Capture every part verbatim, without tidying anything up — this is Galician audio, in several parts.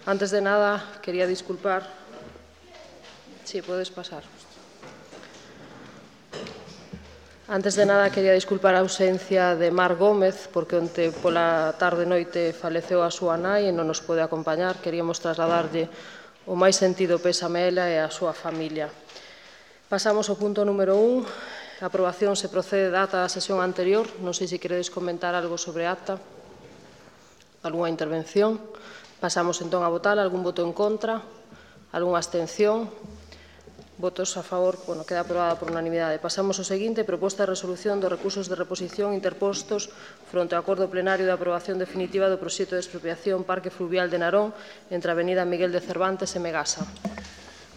Antes de nada, quería disculpar. Sí, puedes pasar. Antes de nada, quería disculpar a ausencia de Mar Gómez, porque onte pola tarde e noite faleceu a súa nai e non nos pode acompañar. Queríamos trasladarlle o máis sentido pésame a ela e a súa familia. Pasamos ao punto número un. A aprobación se procede da ata da sesión anterior. Non sei se queredes comentar algo sobre a acta. Algúnha intervención. Pasamos entón a votar. Algún voto en contra? Algúnha abstención? Votos a favor, bueno, queda aprobada por unanimidade. Pasamos ao seguinte, proposta de resolución dos recursos de reposición interpostos fronte ao acordo plenario de aprobación definitiva do proxecto de expropiación Parque Fluvial de Narón entre a avenida Miguel de Cervantes e Megasa.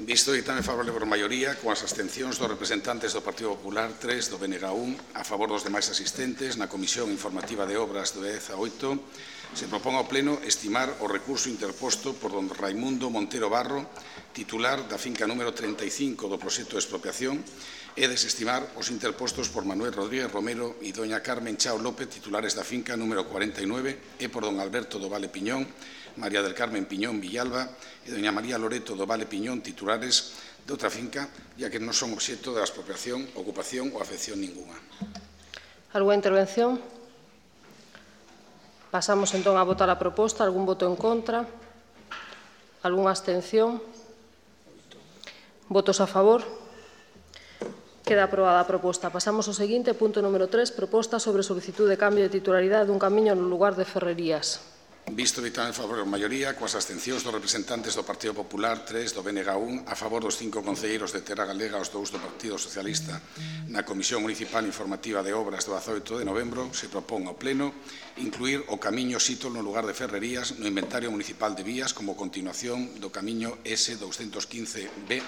Visto ditame favorable por maioría, con as abstencións dos representantes do Partido Popular, tres do B N G un, a favor dos demais asistentes, na Comisión Informativa de Obras do dez a oito, se propón ao Pleno estimar o recurso interposto por don Raimundo Montero Barro, titular da finca número treinta e cinco do proxecto de expropiación, e desestimar os interpostos por Manuel Rodríguez Romero e doña Carmen Chao López, titulares da finca número cuarenta e nove, e por don Alberto do Vale Piñón, María del Carmen Piñón Villalba e doña María Loreto do Vale Piñón, titulares de outra finca, ya que non son obxecto de expropiación, ocupación ou afección ninguna. Algúa intervención? Pasamos entón a votar a proposta. Algún voto en contra? Algúnha abstención? Votos a favor? Queda aprobada a proposta. Pasamos ao seguinte, punto número tres, proposta sobre solicitud de cambio de titularidade dun camiño no lugar de Ferrerías. Visto ditame favorable por maioría, coas abstencións dos representantes do Partido Popular, tres do B N G un, a favor dos cinco concelleiros de Terra Galega, os dous do Partido Socialista, na Comisión Municipal Informativa de Obras do dezaoito de novembro, se propón ao Pleno incluir o camiño Sítol no lugar de Ferrerías no inventario municipal de vías como continuación do camiño S doscientos quince B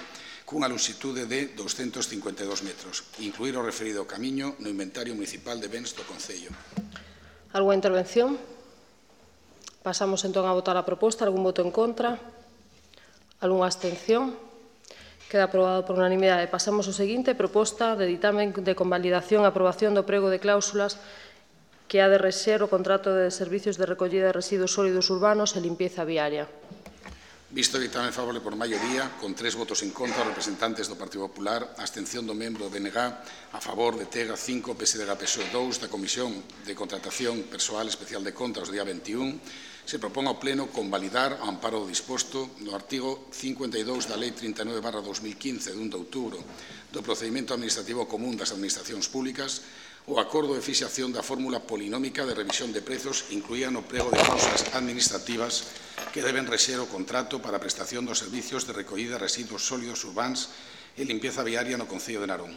cunha longitude de doscientos cincuenta e dous metros, incluir o referido camiño no inventario municipal de bens do Concello. Algúa intervención? Pasamos entón a votar a proposta. Algún voto en contra? Algúnha abstención? Queda aprobado por unanimidade. Pasamos ao seguinte, proposta de ditamen de convalidación e aprobación do prego de cláusulas que ha de rexer o contrato de servicios de recollida de residuos sólidos urbanos e limpieza viaria. Visto o ditame favorable por maioría, con tres votos en contra, representantes do Partido Popular, abstención do membro do B N G, a favor de Tega cinco, P S D G P S O E dous, da Comisión de Contratación Persoal Especial de Contas do día veintiún, se propón ao Pleno convalidar ao amparo do disposto no artigo cincuenta e dous da Lei trinta e nove barra dos mil quince de un de outubro do Procedimento Administrativo Común das Administracións Públicas o acordo de fixación da fórmula polinómica de revisión de prezos incluía no prego de causas administrativas que deben rexer o contrato para a prestación dos servicios de recollida de residuos sólidos urbáns e limpieza viaria no Concello de Narón.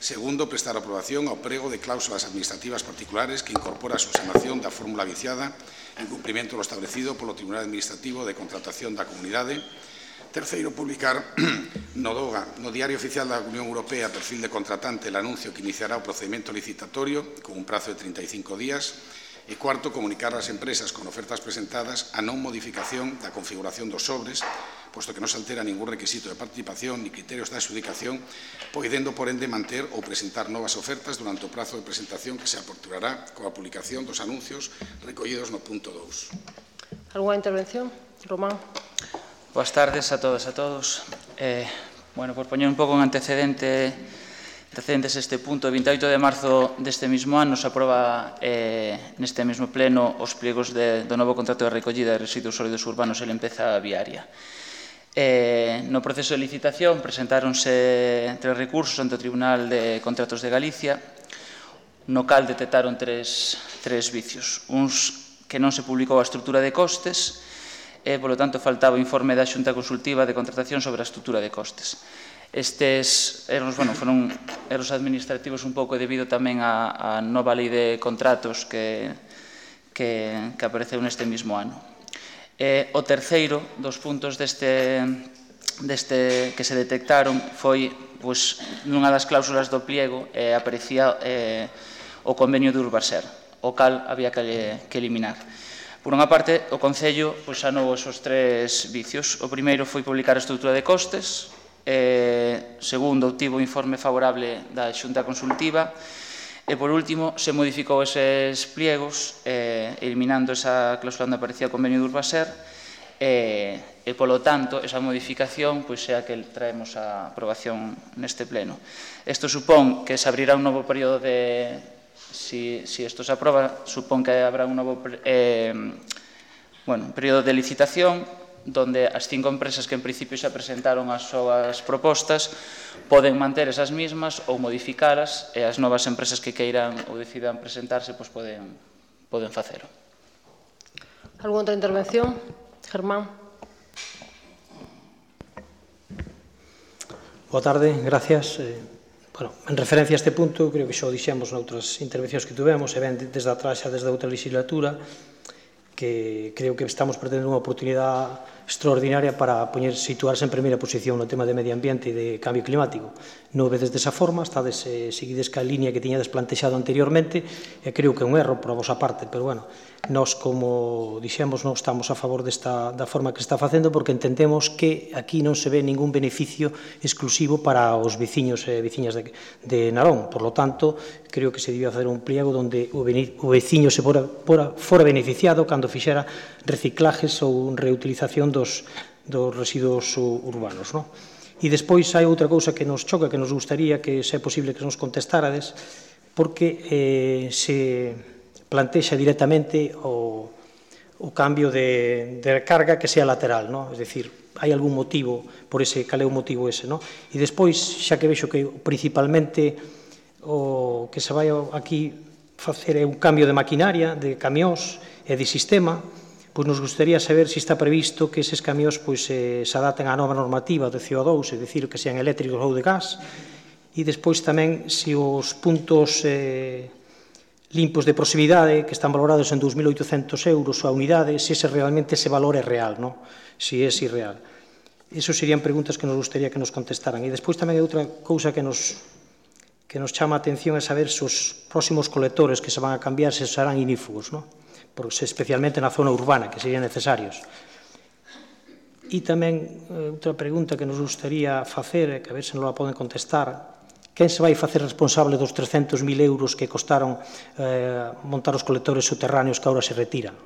Segundo, prestar aprobación ao prego de cláusulas administrativas particulares que incorpora a subsanación da fórmula viciada en cumprimento do establecido polo Tribunal Administrativo de Contratación da Comunidade. Terceiro, publicar no DOGA, no Diario Oficial da Unión Europea, perfil de contratante, el anuncio que iniciará o procedimento licitatorio con un prazo de treinta e cinco días. E cuarto, comunicar ás empresas con ofertas presentadas a non modificación da configuración dos sobres, posto que non se altera ningún requisito de participación ni criterios de adxudicación, podendo, por ende, manter ou presentar novas ofertas durante o prazo de presentación que se aperturará coa publicación dos anuncios recollidos no punto dous. Algúnha intervención? Román. Boas tardes a todas e a todos. Eh, bueno, por poñer un pouco en antecedente Antecedentes este punto, o vinte e oito de marzo deste mesmo ano se aproba eh, neste mesmo pleno os pliegos de, do novo contrato de recollida de residuos sólidos urbanos e limpeza viaria. Eh, no proceso de licitación presentáronse tres recursos ante o Tribunal de Contratos de Galicia, no cal detectaron tres, tres vicios. Uns que non se publicou a estrutura de costes e, polo tanto, faltaba o informe da Xunta Consultiva de Contratación sobre a estrutura de costes. Estes erros, bueno, foron erros administrativos un pouco debido tamén á, á nova lei de contratos que, que, que apareceu neste mesmo ano. E o terceiro dos puntos deste, deste que se detectaron foi, pois, nunha das cláusulas do pliego eh, aparecía eh, o convenio de Urbaser, o cal había que, que eliminar. Por unha parte, o Concello pois, sanou esos tres vicios. O primeiro foi publicar a estrutura de costes. Eh, segundo, obtivo o informe favorable da Xunta Consultiva e, por último, se modificou eses pliegos eh, eliminando esa cláusula onde aparecía o convenio de Urbaser e, e polo tanto, esa modificación pois, é a que traemos a aprobación neste pleno. Isto supón que se abrirá un novo período de, si, si isto se aproba, supón que habrá un novo eh, bueno, período de licitación donde as cinco empresas que en principio xa presentaron as súas propostas poden manter esas mismas ou modificalas e as novas empresas que queiran ou decidan presentarse pois poden, poden facelo. Alguna outra intervención? Germán. Boa tarde, gracias. Eh, bueno, en referencia a este punto, creo que xa o dixemos noutras intervencións que tuvemos, e ben desde atrás xa desde outra legislatura, que creo que estamos perdendo unha oportunidade extraordinaria para poñer, situarse en primeira posición no tema de medio ambiente e de cambio climático. Non vedes desa forma, estades, eh, seguides ca línea que tiñades plantexado anteriormente, e creo que é un erro por a vosa parte, pero, bueno, nós, como dixemos, non estamos a favor desta, da forma que está facendo, porque entendemos que aquí non se ve ningún beneficio exclusivo para os veciños e veciñas de, de Narón. Por lo tanto, creo que se debía facer un pliego onde o, o veciño se fora, fora, fora beneficiado cando fixera reciclajes ou reutilización dos, dos residuos urbanos, non? E despois hai outra cousa que nos choca, que nos gustaría que, se é posible, que nos contestarades, porque eh, se plantexa directamente o, o cambio de, de carga que sea lateral, non? Es dicir, hai algún motivo por ese, cal é o motivo ese, non? E despois, xa que vexo que principalmente o que se vai aquí facer é un cambio de maquinaria, de camións e de sistema, pois nos gustaría saber se está previsto que eses camións pois, eh, se adapten á nova normativa de C O dous, é dicir, que sean eléctricos ou de gas, e despois tamén se os puntos eh, limpos de proximidade, que están valorados en dous mil oitocentos euros a unidade, se ese realmente ese valor é real, non? Se é irreal. Eso serían preguntas que nos gustaría que nos contestaran. E despois tamén hai outra cousa que nos, que nos chama a atención é saber se os próximos colectores que se van a cambiar se serán inífugos, non? Porque especialmente na zona urbana, que serían necesarios. E tamén outra pregunta que nos gustaría facer, que a ver se non la poden contestar, quen se vai facer responsable dos trescentos mil euros que costaron eh, montar os colectores subterráneos que agora se retiran?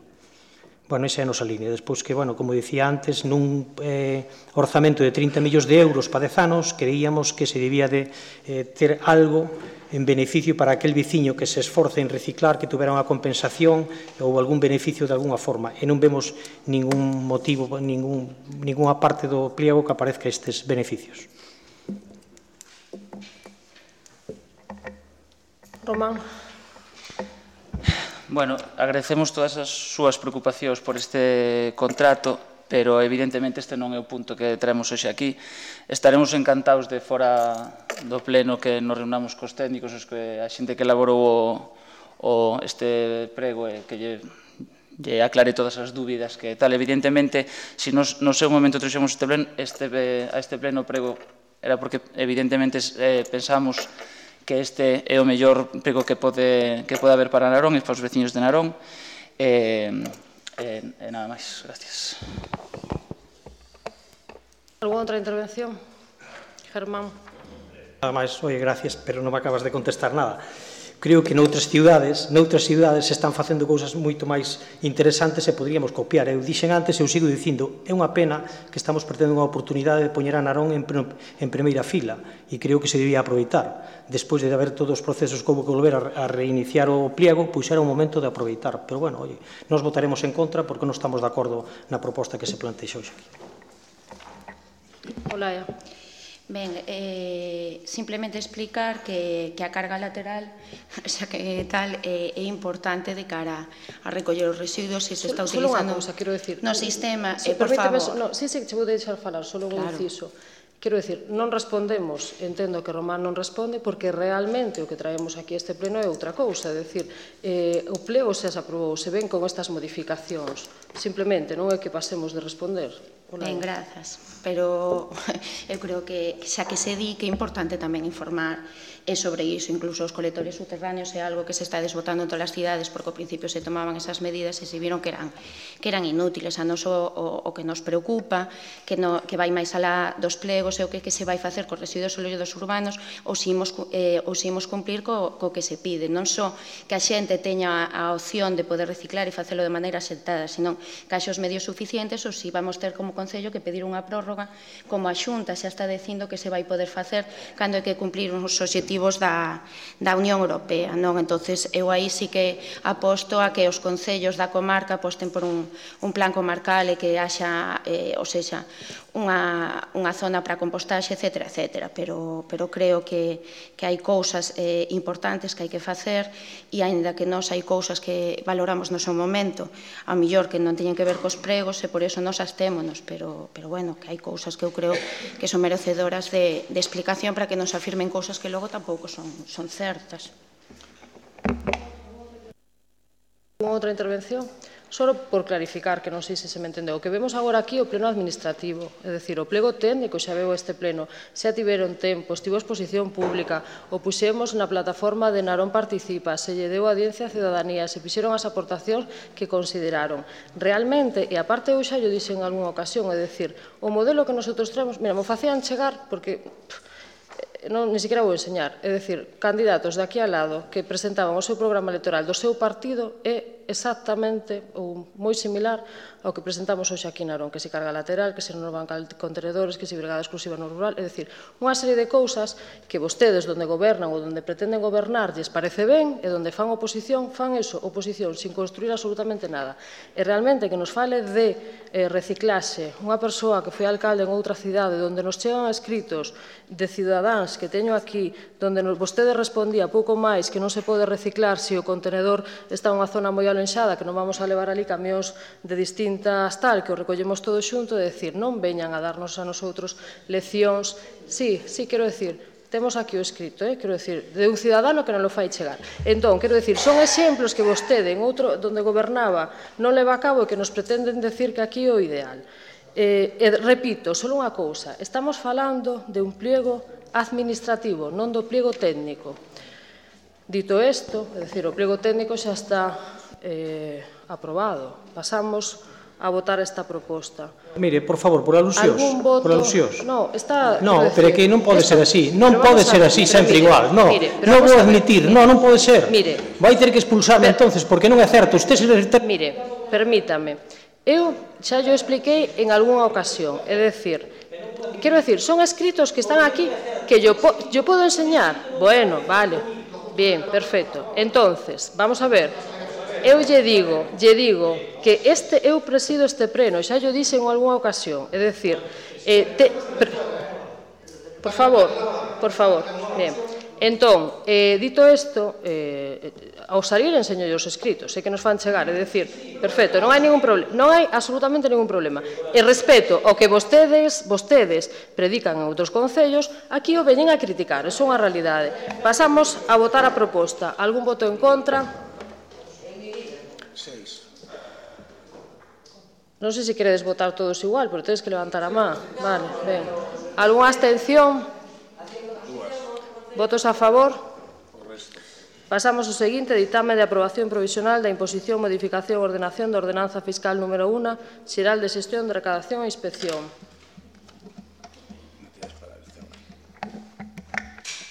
Bueno, esa é a nosa línea. Despois que, bueno, como dicía antes, nun eh, orzamento de trinta millóns de euros para dez anos, creíamos que se debía de eh, ter algo en beneficio para aquel veciño que se esforce en reciclar, que tuvera unha compensación ou algún beneficio de alguna forma. E non vemos ningún motivo, ningún, ninguna parte do pliego que aparezca estes beneficios. Román. Bueno, agradecemos todas as súas preocupacións por este contrato, pero evidentemente este non é o punto que traemos hoxe aquí. Estaremos encantados de fora do pleno que nos reunamos cos técnicos, os que, a xente que elaborou o, o este prego e que lle, lle aclare todas as dúbidas que tal. Evidentemente, se nos, no seu momento trouxemos este pleno, este, a este pleno prego era porque evidentemente eh, pensamos que este é o mellor prego que pode, que pode haber para Narón e para os veciños de Narón. E, e, e nada máis. Gracias. Alguna outra intervención? Germán. Nada máis, oye, gracias, pero non me acabas de contestar nada. Creo que noutras ciudades, noutras ciudades se están facendo cousas moito máis interesantes e poderíamos copiar. Eu dixen antes e eu sigo dicindo, é unha pena que estamos perdendo unha oportunidade de poñer a Narón en, en primeira fila e creo que se debía aproveitar. Despois de haber todos os procesos que houve que volver a, a reiniciar o pliego, pois era un momento de aproveitar. Pero, bueno, oye, nos votaremos en contra porque non estamos de acordo na proposta que se plantexa hoxe aquí. Olaya. Ben, eh, simplemente explicar que, que a carga lateral, xa que tal, é, é importante de cara a recoller os residuos se se está Solo utilizando unha cousa, quero decir, no sistema, si, eh, por permíteme, favor. No, sí, sí, che vou deixar falar, solo un Claro. inciso. Quero decir, non respondemos, entendo que Román non responde, porque realmente o que traemos aquí a este pleno é outra cousa, é dicir, eh, o plego xa se aprobou, se ven con estas modificacións, simplemente non é que pasemos de responder. Ben, grazas. Pero eu creo que xa que se di que é importante tamén informar e sobre iso, incluso os colectores subterráneos é algo que se está desbotando en todas as cidades porque ao principio se tomaban esas medidas e se viron que eran, que eran inútiles. A nos o, o, o que nos preocupa, que, no, que vai máis alá dos plegos, é o que, que se vai facer cos residuos sólidos urbanos ou se imos, eh, ou se imos cumplir co, co que se pide. Non só que a xente teña a opción de poder reciclar e facelo de maneira sentada, senón que haxe os medios suficientes ou se vamos ter como Concello que pedir unha prórroga, como a Xunta xa está dicindo que se vai poder facer cando hai que cumplir uns obxectivos da, da Unión Europea, non? Entonces, eu aí sí que aposto a que os concellos da comarca aposten por un, un plan comarcal e que haxa, eh, ou seja, unha, unha zona para compostaxe, etcétera, etcétera. Pero, pero creo que, que hai cousas eh, importantes que hai que facer e, aínda que nós hai cousas que valoramos no seu momento, a mellor que non teñen que ver cos pregos e por iso nos astémonos, pero, pero bueno, que hai cousas que eu creo que son merecedoras de, de explicación para que nos afirmen cousas que logo tampouco son, son certas. Outra intervención? Só por clarificar, que non sei se se me entendeu. O que vemos agora aquí é o pleno administrativo, é dicir, o plego técnico xa veu este pleno, xa tiveron tempo, estivo a exposición pública, o puxemos na plataforma de Narón Participa, se lle deu audiencia á ciudadanía, se fixeron as aportacións que consideraron. Realmente, e aparte eu xa yo dixen en algunha ocasión, é dicir, o modelo que nosotros traemos, mira, me facían chegar, porque non, ni siquiera vou enseñar, é dicir, candidatos de aquí al lado que presentaban o seu programa electoral do seu partido é exactamente ou moi similar ao que presentamos hoxe aquí en Narón, que se carga lateral, que se renovan contenedores, que se brigada exclusiva no rural, é dicir, unha serie de cousas que vostedes donde gobernan ou donde pretenden gobernar lles parece ben e donde fan oposición, fan eso, oposición, sin construir absolutamente nada. E realmente que nos fale de eh, reciclaxe, unha persoa que foi alcalde en outra cidade onde nos chegan escritos de cidadáns que teño aquí, donde vostede respondía pouco máis que non se pode reciclar se o contenedor está en unha zona moi alenxada, que non vamos a levar ali camións de distintas tal, que o recollemos todo xunto, de decir, non veñan a darnos a nosotros leccións. Sí, sí, quero decir, temos aquí o escrito, eh? Quero decir, de un cidadano que non lo fai chegar. Entón, quero decir, son exemplos que vostede en outro, donde gobernaba, non leva a cabo e que nos pretenden decir que aquí é o ideal. Eh, e repito, só unha cousa, estamos falando de un pliego administrativo, non do pliego técnico. Dito isto, é dicir, o pliego técnico xa está eh, aprobado. Pasamos a votar esta proposta. Mire, por favor, por alusións. Voto... Por alusións. No, está... No, decir, pero é que non pode esto... ser así. Non pode ser así sempre mire, igual. No, mire, non vou admitir. No, non pode ser. Mire. Vai ter que expulsarme pero, entonces, porque non é certo. Usted se... Mire, permítame. Eu xa yo expliquei en algunha ocasión. É dicir, quero decir, son escritos que están aquí que yo, po yo podo enseñar. Bueno, vale. Bien, perfecto. Entonces, vamos a ver. Eu lle digo, lle digo que este, eu presido este pleno, xa yo dixen en algunha ocasión, é dicir, eh, te, pre, por favor, por favor, ben, entón, eh, dito isto, eh, ao salir enseño os escritos, sei que nos fan chegar, é dicir, perfecto, non hai ningún problema, non hai absolutamente ningún problema, e respeto ao que vostedes, vostedes predican en outros concellos, aquí o veñen a criticar, é unha realidade. Pasamos a votar a proposta, algún voto en contra? Non sei se queredes votar todos igual, pero tedes que levantar a má. Vale, ben. Algúnha abstención? Votos a favor? Pasamos ao seguinte, ditame de aprobación provisional da imposición, modificación e ordenación da ordenanza fiscal número uno, xeral de xestión de recadación e inspección.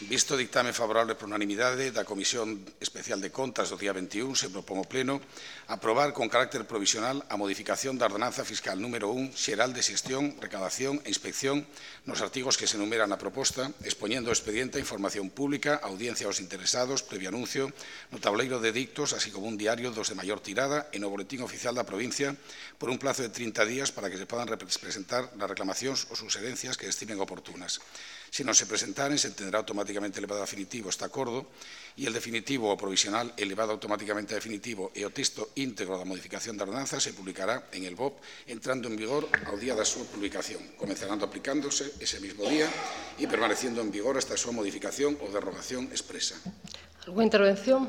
Visto o dictame favorable por unanimidade da Comisión Especial de Contas do día veintiún, se propón ao Pleno aprobar con carácter provisional a modificación da ordenanza fiscal número un, xeral de xestión, recadación e inspección nos artigos que se enumeran na proposta, expoñendo o expediente a información pública, audiencia aos interesados, previo anuncio, no tableiro de dictos, así como un diario dos de maior tirada e no boletín oficial da provincia por un plazo de trinta días para que se podan presentar las reclamacións ou suxerencias que estimen oportunas. Se non se presentaren, se entenderá automáticamente elevado a definitivo este acordo e el definitivo ou provisional elevado automáticamente a definitivo e o texto íntegro da modificación da ordenanza se publicará en el B O P entrando en vigor ao día da súa publicación, comenzarando aplicándose ese mismo día e permaneciendo en vigor hasta a súa modificación ou derrogación expresa. Alguna intervención?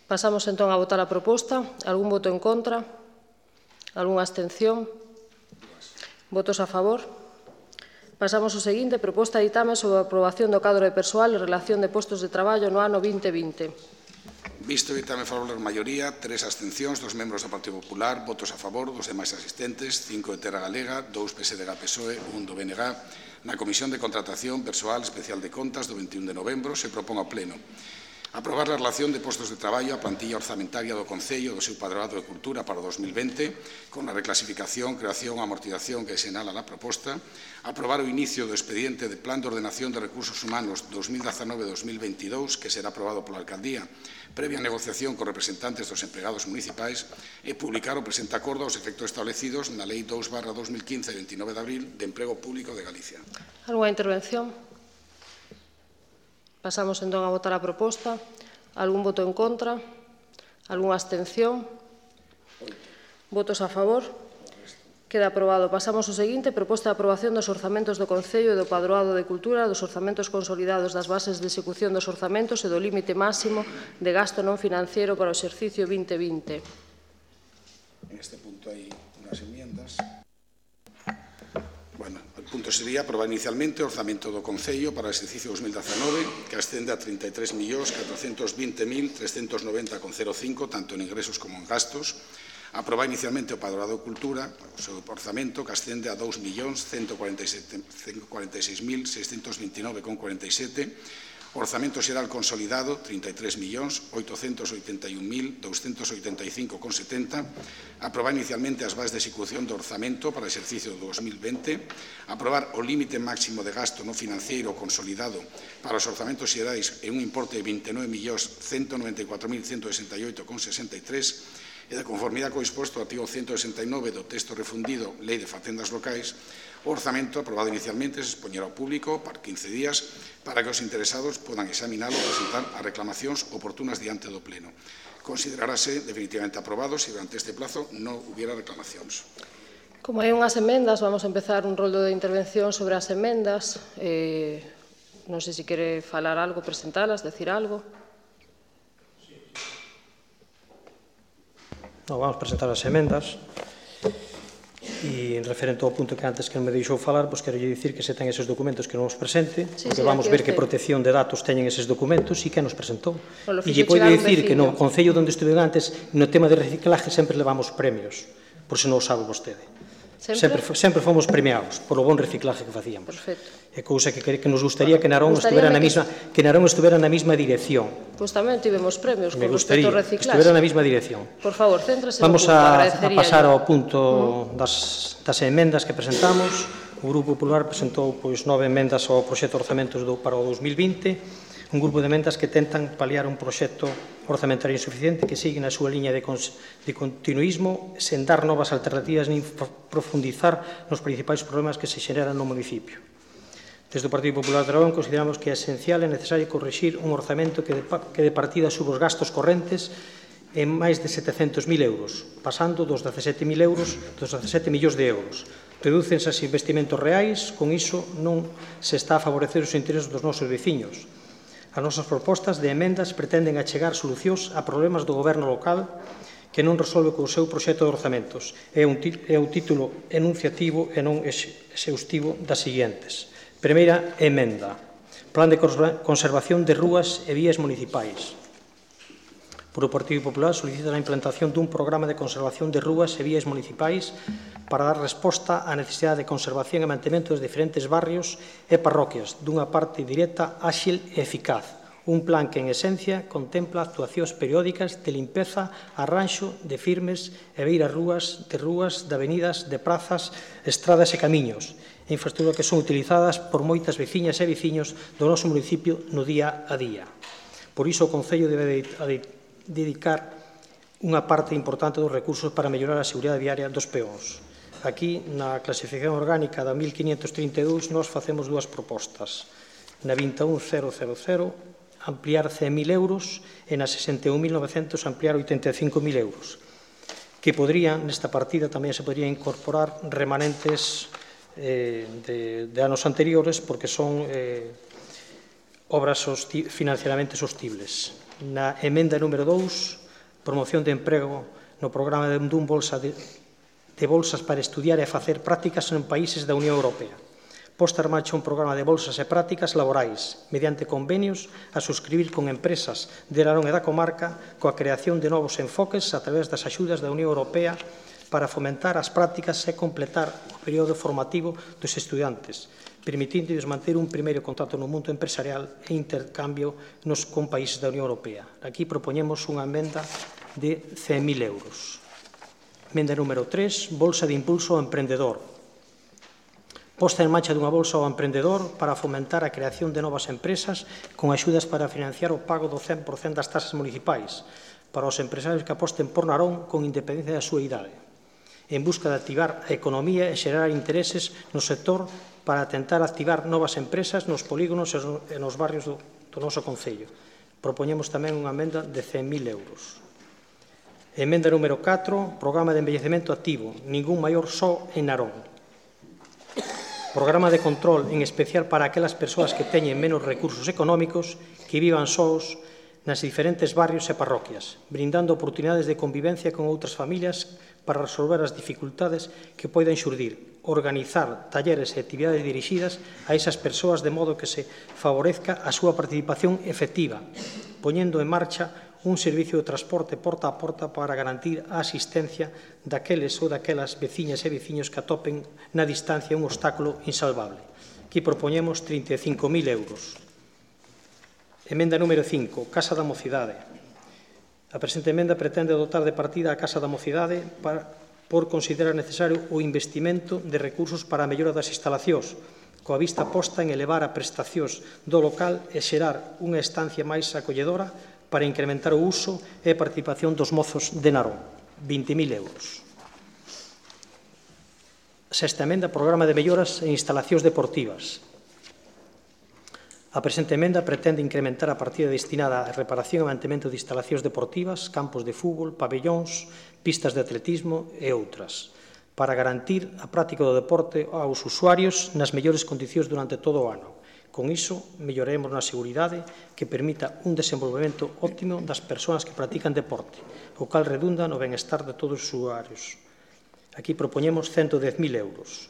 Pasamos entón a votar a proposta. Algún voto en contra? Algúnha abstención? Votos a favor? Pasamos ao seguinte, proposta de ditame sobre a aprobación do cadro de persoal e relación de postos de traballo no ano vinte vinte. Visto o ditame favorável por maioría, tres abstencións, dos membros do Partido Popular, votos a favor, dos demais asistentes, cinco de Terra Galega, dous P S D G P S O E, un do B N G, na Comisión de Contratación Persoal Especial de Contas do veintiún de novembro se propón ao Pleno aprobar a relación de postos de traballo a plantilla orzamentaria do Concello do seu Padroado de Cultura para o dos mil vinte, con a reclasificación, creación e amortización que senala na proposta, aprobar o inicio do expediente de Plan de Ordenación de Recursos Humanos dos mil dezanove a dos mil veintidós, que será aprobado pola Alcaldía, previa negociación con representantes dos empregados municipais, e publicar o presente acordo aos efectos establecidos na Lei dous barra dos mil quince de veintinueve de abril de Emprego Público de Galicia. Alguna intervención? Pasamos entón a votar a proposta. Algún voto en contra? Algúnha abstención? Votos a favor? Queda aprobado. Pasamos ao seguinte, proposta de aprobación dos orzamentos do Concello e do Padroado de Cultura, dos orzamentos consolidados das bases de execución dos orzamentos e do límite máximo de gasto non financiero para o exercicio vinte vinte. En este punto hai unhas enmiendas. Bueno, o punto sería aprobar inicialmente o orzamento do Concello para o exercicio dos mil dezanove, que ascende a trinta e tres millóns catrocentos vinte mil trescentos noventa con cero cinco, tanto en ingresos como en gastos. Aprobar inicialmente o Padroado de Cultura, o seu orzamento, que ascende a dous millóns ciento cuarenta e seis mil seiscentos veintinueve con cuarenta e sete. Orzamento xeral consolidado, trinta e tres millóns oitocentos oitenta e un mil douscentos oitenta e cinco con setenta. Aprobar inicialmente as bases de execución do orzamento para o exercicio do dos mil vinte. Aprobar o límite máximo de gasto non financiero consolidado para os orzamentos xerais en un importe de vinte e nove millóns ciento noventa e catro mil ciento sesenta e oito con sesenta e tres. E de conformidade co disposto do artigo ciento sesenta e nove do texto refundido Lei de Facendas Locais, o orzamento aprobado inicialmente se expoñerá ao público para quince días para que os interesados podan examinalo e presentar as reclamacións oportunas diante do Pleno. Considerarase definitivamente aprobado se durante este plazo non hubiera reclamacións. Como hai unhas emendas, vamos a empezar un roldo de intervención sobre as emendas. Eh, non sei se quere falar algo, presentalas, decir algo. No, vamos presentar as emendas. E en referente ao punto que antes que non me deixou falar, pois quero dicir que se ten eses documentos que non os presente, sí, porque sí, vamos ver que este. protección de datos teñen eses documentos e que nos presentou. Bueno, e lle podo dicir que no Concello onde estuve antes, no tema de reciclaje sempre levamos premios, por se non o sabe vostede. Sempre? Sempre, sempre fomos premiados polo bon reciclaje que facíamos. Perfecto. É cousa que, que nos gustaría que Narón estuvera na mesma que Narón estuvera na mesma dirección. Pois tamén tivemos premios Me con respecto gustaría ao que reciclaje. estuvera na mesma dirección. Por favor, céntrase Vamos no punto, a, a pasar yo. ao punto das, das emendas que presentamos. O Grupo Popular presentou pois, nove emendas ao proxecto de orzamentos do, para o dos mil vinte, un grupo de emendas que tentan paliar un proxecto orzamentario insuficiente que sigue na súa liña de, cons, de continuismo sen dar novas alternativas nin profundizar nos principais problemas que se xeneran no municipio. Desde o Partido Popular de Aragón consideramos que é esencial e necesario corrixir un orzamento que de, que de partida suba os gastos correntes en máis de setecentos mil euros, pasando dos dezasete mil euros, dos dezasete millóns de euros. Redúcense os investimentos reais, con iso non se está a favorecer os intereses dos nosos veciños. As nosas propostas de emendas pretenden achegar solucións a problemas do goberno local que non resolve co seu proxecto de orzamentos. É un, é un título enunciativo e non exhaustivo das seguintes. Primeira emenda. Plan de conservación de rúas e vías municipais. Por o Partido Popular solicita a implantación dun programa de conservación de rúas e vías municipais para dar resposta á necesidade de conservación e mantemento dos diferentes barrios e parroquias dunha parte directa, áxil e eficaz. Un plan que, en esencia, contempla actuacións periódicas de limpeza, arranxo de firmes e beiras rúas, de rúas, de avenidas, de prazas, estradas e camiños, infraestructuras que son utilizadas por moitas veciñas e veciños do noso municipio no día a día. Por iso, o Concello debe dedicar unha parte importante dos recursos para mellorar a seguridade viaria dos peóns. Aquí, na clasificación orgánica da mil quinhentos trinta e dous, nós facemos dúas propostas. Na vinte e un mil ampliar cen mil euros e na sesenta e un mil novecentos ampliar oitenta e cinco mil euros, que podrían, nesta partida tamén se podría incorporar remanentes eh, de, de anos anteriores porque son eh, obras sosti financieramente sostibles. Na emenda número dous, promoción de emprego no programa de dun bolsa de de bolsas para estudiar e facer prácticas en países da Unión Europea. Posta en marcha un programa de bolsas e prácticas laborais, mediante convenios a suscribir con empresas de Narón e da comarca, coa creación de novos enfoques a través das axudas da Unión Europea para fomentar as prácticas e completar o período formativo dos estudantes, permitíndoles manter un primeiro contacto no mundo empresarial e intercambio nos con países da Unión Europea. Aquí propoñemos unha emenda de cen mil euros. Emenda número tres, bolsa de impulso ao emprendedor. Posta en marcha dunha bolsa ao emprendedor para fomentar a creación de novas empresas con axudas para financiar o pago do cen por cento das tasas municipais para os empresarios que aposten por Narón con independencia da súa idade, en busca de activar a economía e xerar intereses no sector para tentar activar novas empresas nos polígonos e nos barrios do, do noso concello. Propoñemos tamén unha emenda de cen mil euros. Emenda número catro, programa de envellecemento activo, ningún maior só en Narón. Programa de control, en especial para aquelas persoas que teñen menos recursos económicos, que vivan sós nas diferentes barrios e parroquias, brindando oportunidades de convivencia con outras familias para resolver as dificultades que poden xurdir, organizar talleres e actividades dirixidas a esas persoas de modo que se favorezca a súa participación efectiva, poñendo en marcha un servicio de transporte porta a porta para garantir a asistencia daqueles ou daquelas veciñas e veciños que atopen na distancia un obstáculo insalvable. Aquí propoñemos trinta e cinco mil euros. Emenda número cinco, Casa da Mocidade. A presente emenda pretende dotar de partida a Casa da Mocidade para, por considerar necesario o investimento de recursos para a mellora das instalacións, coa vista posta en elevar a prestacións do local e xerar unha estancia máis acolledora para incrementar o uso e a participación dos mozos de Narón, vinte mil euros. Sexta emenda, programa de melloras en instalacións deportivas. A presente emenda pretende incrementar a partida destinada á reparación e mantemento de instalacións deportivas, campos de fútbol, pabellóns, pistas de atletismo e outras, para garantir a práctica do deporte aos usuarios nas mellores condicións durante todo o ano. Con iso, melloremos na seguridade que permita un desenvolvemento óptimo das persoas que practican deporte, o cal redunda no benestar de todos os usuarios. Aquí propoñemos ciento dez mil euros.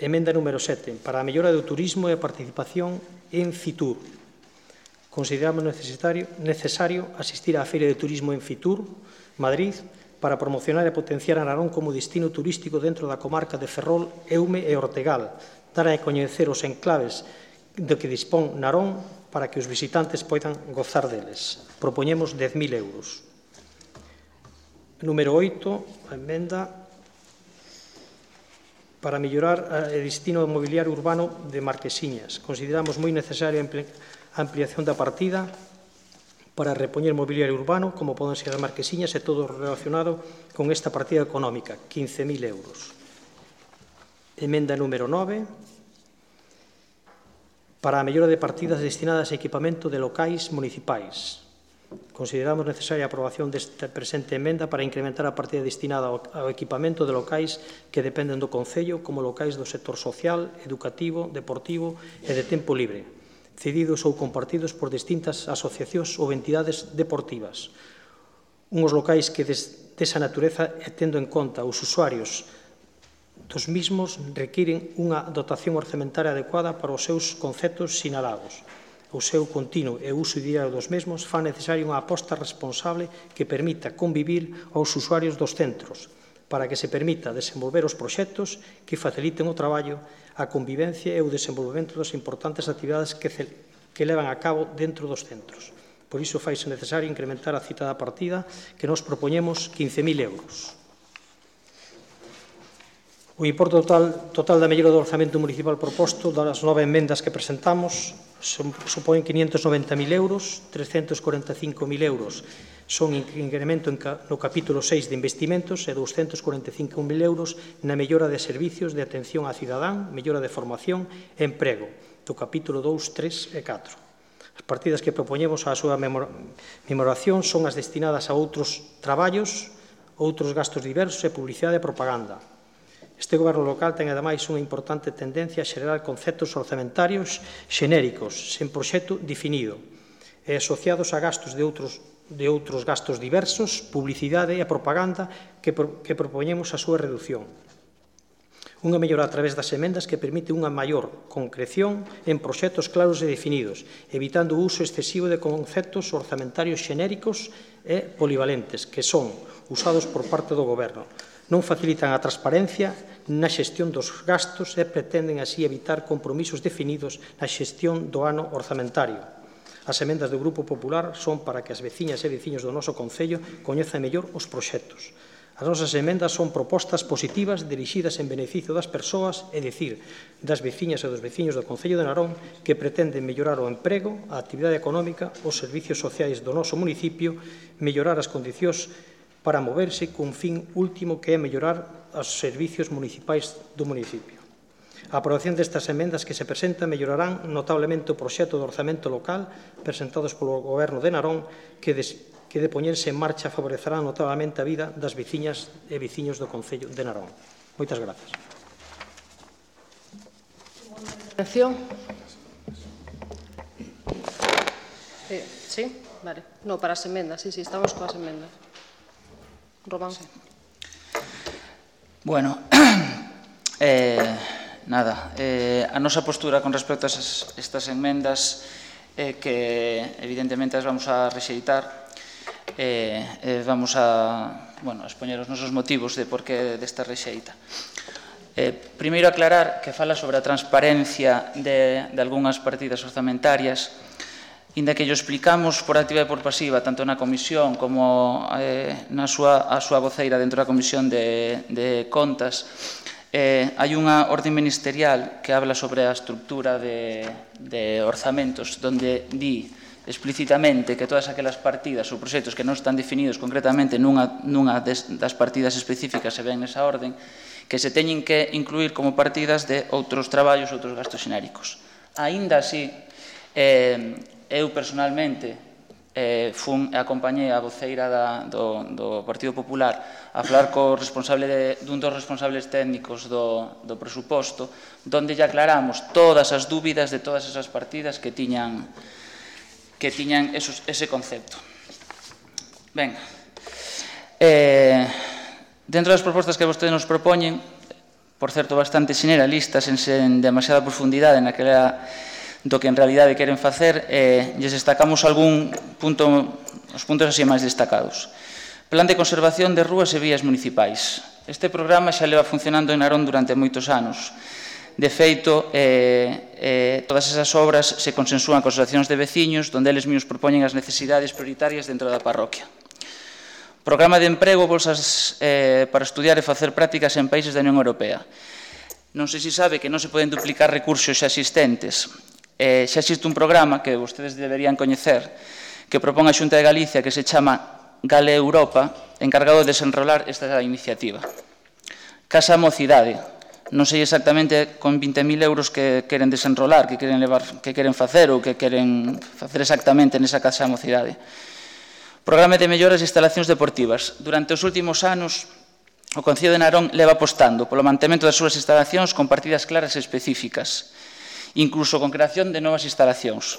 Emenda número sete, para a mellora do turismo e a participación en Fitur. Consideramos necesario, necesario asistir á Feira de Turismo en Fitur, Madrid, para promocionar e potenciar a Narón como destino turístico dentro da comarca de Ferrol, Eume e Ortegal, dar a coñecer os enclaves de que dispón Narón para que os visitantes poidan gozar deles. Propoñemos dez mil euros. Número oito, a emenda para mellorar o destino mobiliario urbano de Marquesiñas. Consideramos moi necesaria a ampliación da partida para repoñer mobiliario urbano, como poden ser as Marquesiñas e todo relacionado con esta partida económica, quince mil euros. Emenda número nove, para a mellora de partidas destinadas a equipamento de locais municipais. Consideramos necesaria a aprobación desta presente emenda para incrementar a partida destinada ao equipamento de locais que dependen do Concello como locais do sector social, educativo, deportivo e de tempo libre, cedidos ou compartidos por distintas asociacións ou entidades deportivas. Unhos locais que desa natureza, tendo en conta os usuarios dos mismos, requiren unha dotación orzamentaria adecuada para os seus conceptos sinalados. O seu continuo e uso diario dos mesmos fan necesaria unha aposta responsable que permita convivir aos usuarios dos centros, para que se permita desenvolver os proxectos que faciliten o traballo, a convivencia e o desenvolvemento das importantes actividades que, que levan a cabo dentro dos centros. Por iso faise necesario incrementar a citada partida que nos propoñemos quince mil euros. O importe total, total da mellora do orzamento municipal proposto das nove emendas que presentamos supón quinientos noventa mil euros, trescentos cuarenta e cinco mil euros son incremento no capítulo seis de investimentos e doscentos cuarenta e cinco mil euros na mellora de servicios de atención a cidadán, mellora de formación e emprego, do capítulo dous, tres e catro. As partidas que propoñemos á súa memoración son as destinadas a outros traballos, outros gastos diversos e publicidade e propaganda. Este goberno local ten, ademais, unha importante tendencia a xerar conceptos orzamentarios xenéricos, sen proxecto definido, e asociados a gastos de outros de outros gastos diversos, publicidade e propaganda que, pro, que propoñemos a súa reducción. Unha mellora a través das emendas que permite unha maior concreción en proxectos claros e definidos, evitando o uso excesivo de conceptos orzamentarios xenéricos e polivalentes que son usados por parte do Goberno. Non facilitan a transparencia na xestión dos gastos e pretenden así evitar compromisos definidos na xestión do ano orzamentario. As emendas do Grupo Popular son para que as veciñas e veciños do noso Concello coñezan mellor os proxectos. As nosas emendas son propostas positivas dirixidas en beneficio das persoas, é dicir, das veciñas e dos veciños do Concello de Narón que pretenden mellorar o emprego, a actividade económica, os servicios sociais do noso municipio, mellorar as condicións para moverse cun fin último que é mellorar os servicios municipais do municipio. A aprobación destas emendas que se presentan mellorarán notablemente o proxecto de orzamento local presentados polo Goberno de Narón que des que de poñerse en marcha favorecerá notablemente a vida das veciñas e veciños do Concello de Narón. Moitas grazas. Atención. Eh, sí, vale. No, para as emendas, sí, sí, estamos coas emendas. Román. Sí. Bueno, eh, nada, eh, a nosa postura con respecto a esas, estas enmendas eh, que evidentemente as vamos a rexeitar. Eh, eh, vamos a, bueno, a expoñer os nosos motivos de por que desta rexeita. Eh, primeiro aclarar que fala sobre a transparencia de, de algunhas partidas orzamentarias, inda que yo explicamos por activa e por pasiva, tanto na comisión como eh, na súa, a súa voceira dentro da comisión de, de contas. Eh, hai unha orde ministerial que habla sobre a estructura de, de orzamentos, donde di explícitamente que todas aquelas partidas ou proxectos que non están definidos concretamente nunha, nunha des, das partidas específicas se ven nesa orden, que se teñen que incluir como partidas de outros traballos, outros gastos xenéricos. Aínda así, eh, eu personalmente eh, fun e acompañei a voceira da, do, do Partido Popular a falar co responsable de, dun dos responsables técnicos do, do presuposto, donde lle aclaramos todas as dúbidas de todas esas partidas que tiñan que tiñan esos, ese concepto. Ben, eh, dentro das propostas que vostedes nos propoñen, por certo bastante generalistas, en, en demasiada profundidade naquela do que en realidade queren facer, eh, lles destacamos algún punto, os puntos así máis destacados. Plan de conservación de rúas e vías municipais. Este programa xa leva funcionando en Narón durante moitos anos. De feito, eh, eh, todas esas obras se consensúan con asociacións de veciños, donde eles mesmos propoñen as necesidades prioritarias dentro da parroquia. Programa de emprego, bolsas eh, para estudiar e facer prácticas en países da Unión Europea. Non sei se sabe que non se poden duplicar recursos xa existentes. Eh, xa existe un programa que vostedes deberían coñecer, que propón a Xunta de Galicia, que se chama Gale Europa, encargado de desenrolar esta iniciativa. Casa Mocidade. Non sei exactamente con vinte mil euros que queren desenrolar, que queren, levar, que queren facer ou que queren facer exactamente nesa Casa Mocidade. Programa de melloras e instalacións deportivas. Durante os últimos anos, o Concello de Narón leva apostando polo mantemento das súas instalacións con partidas claras e específicas, incluso con creación de novas instalacións.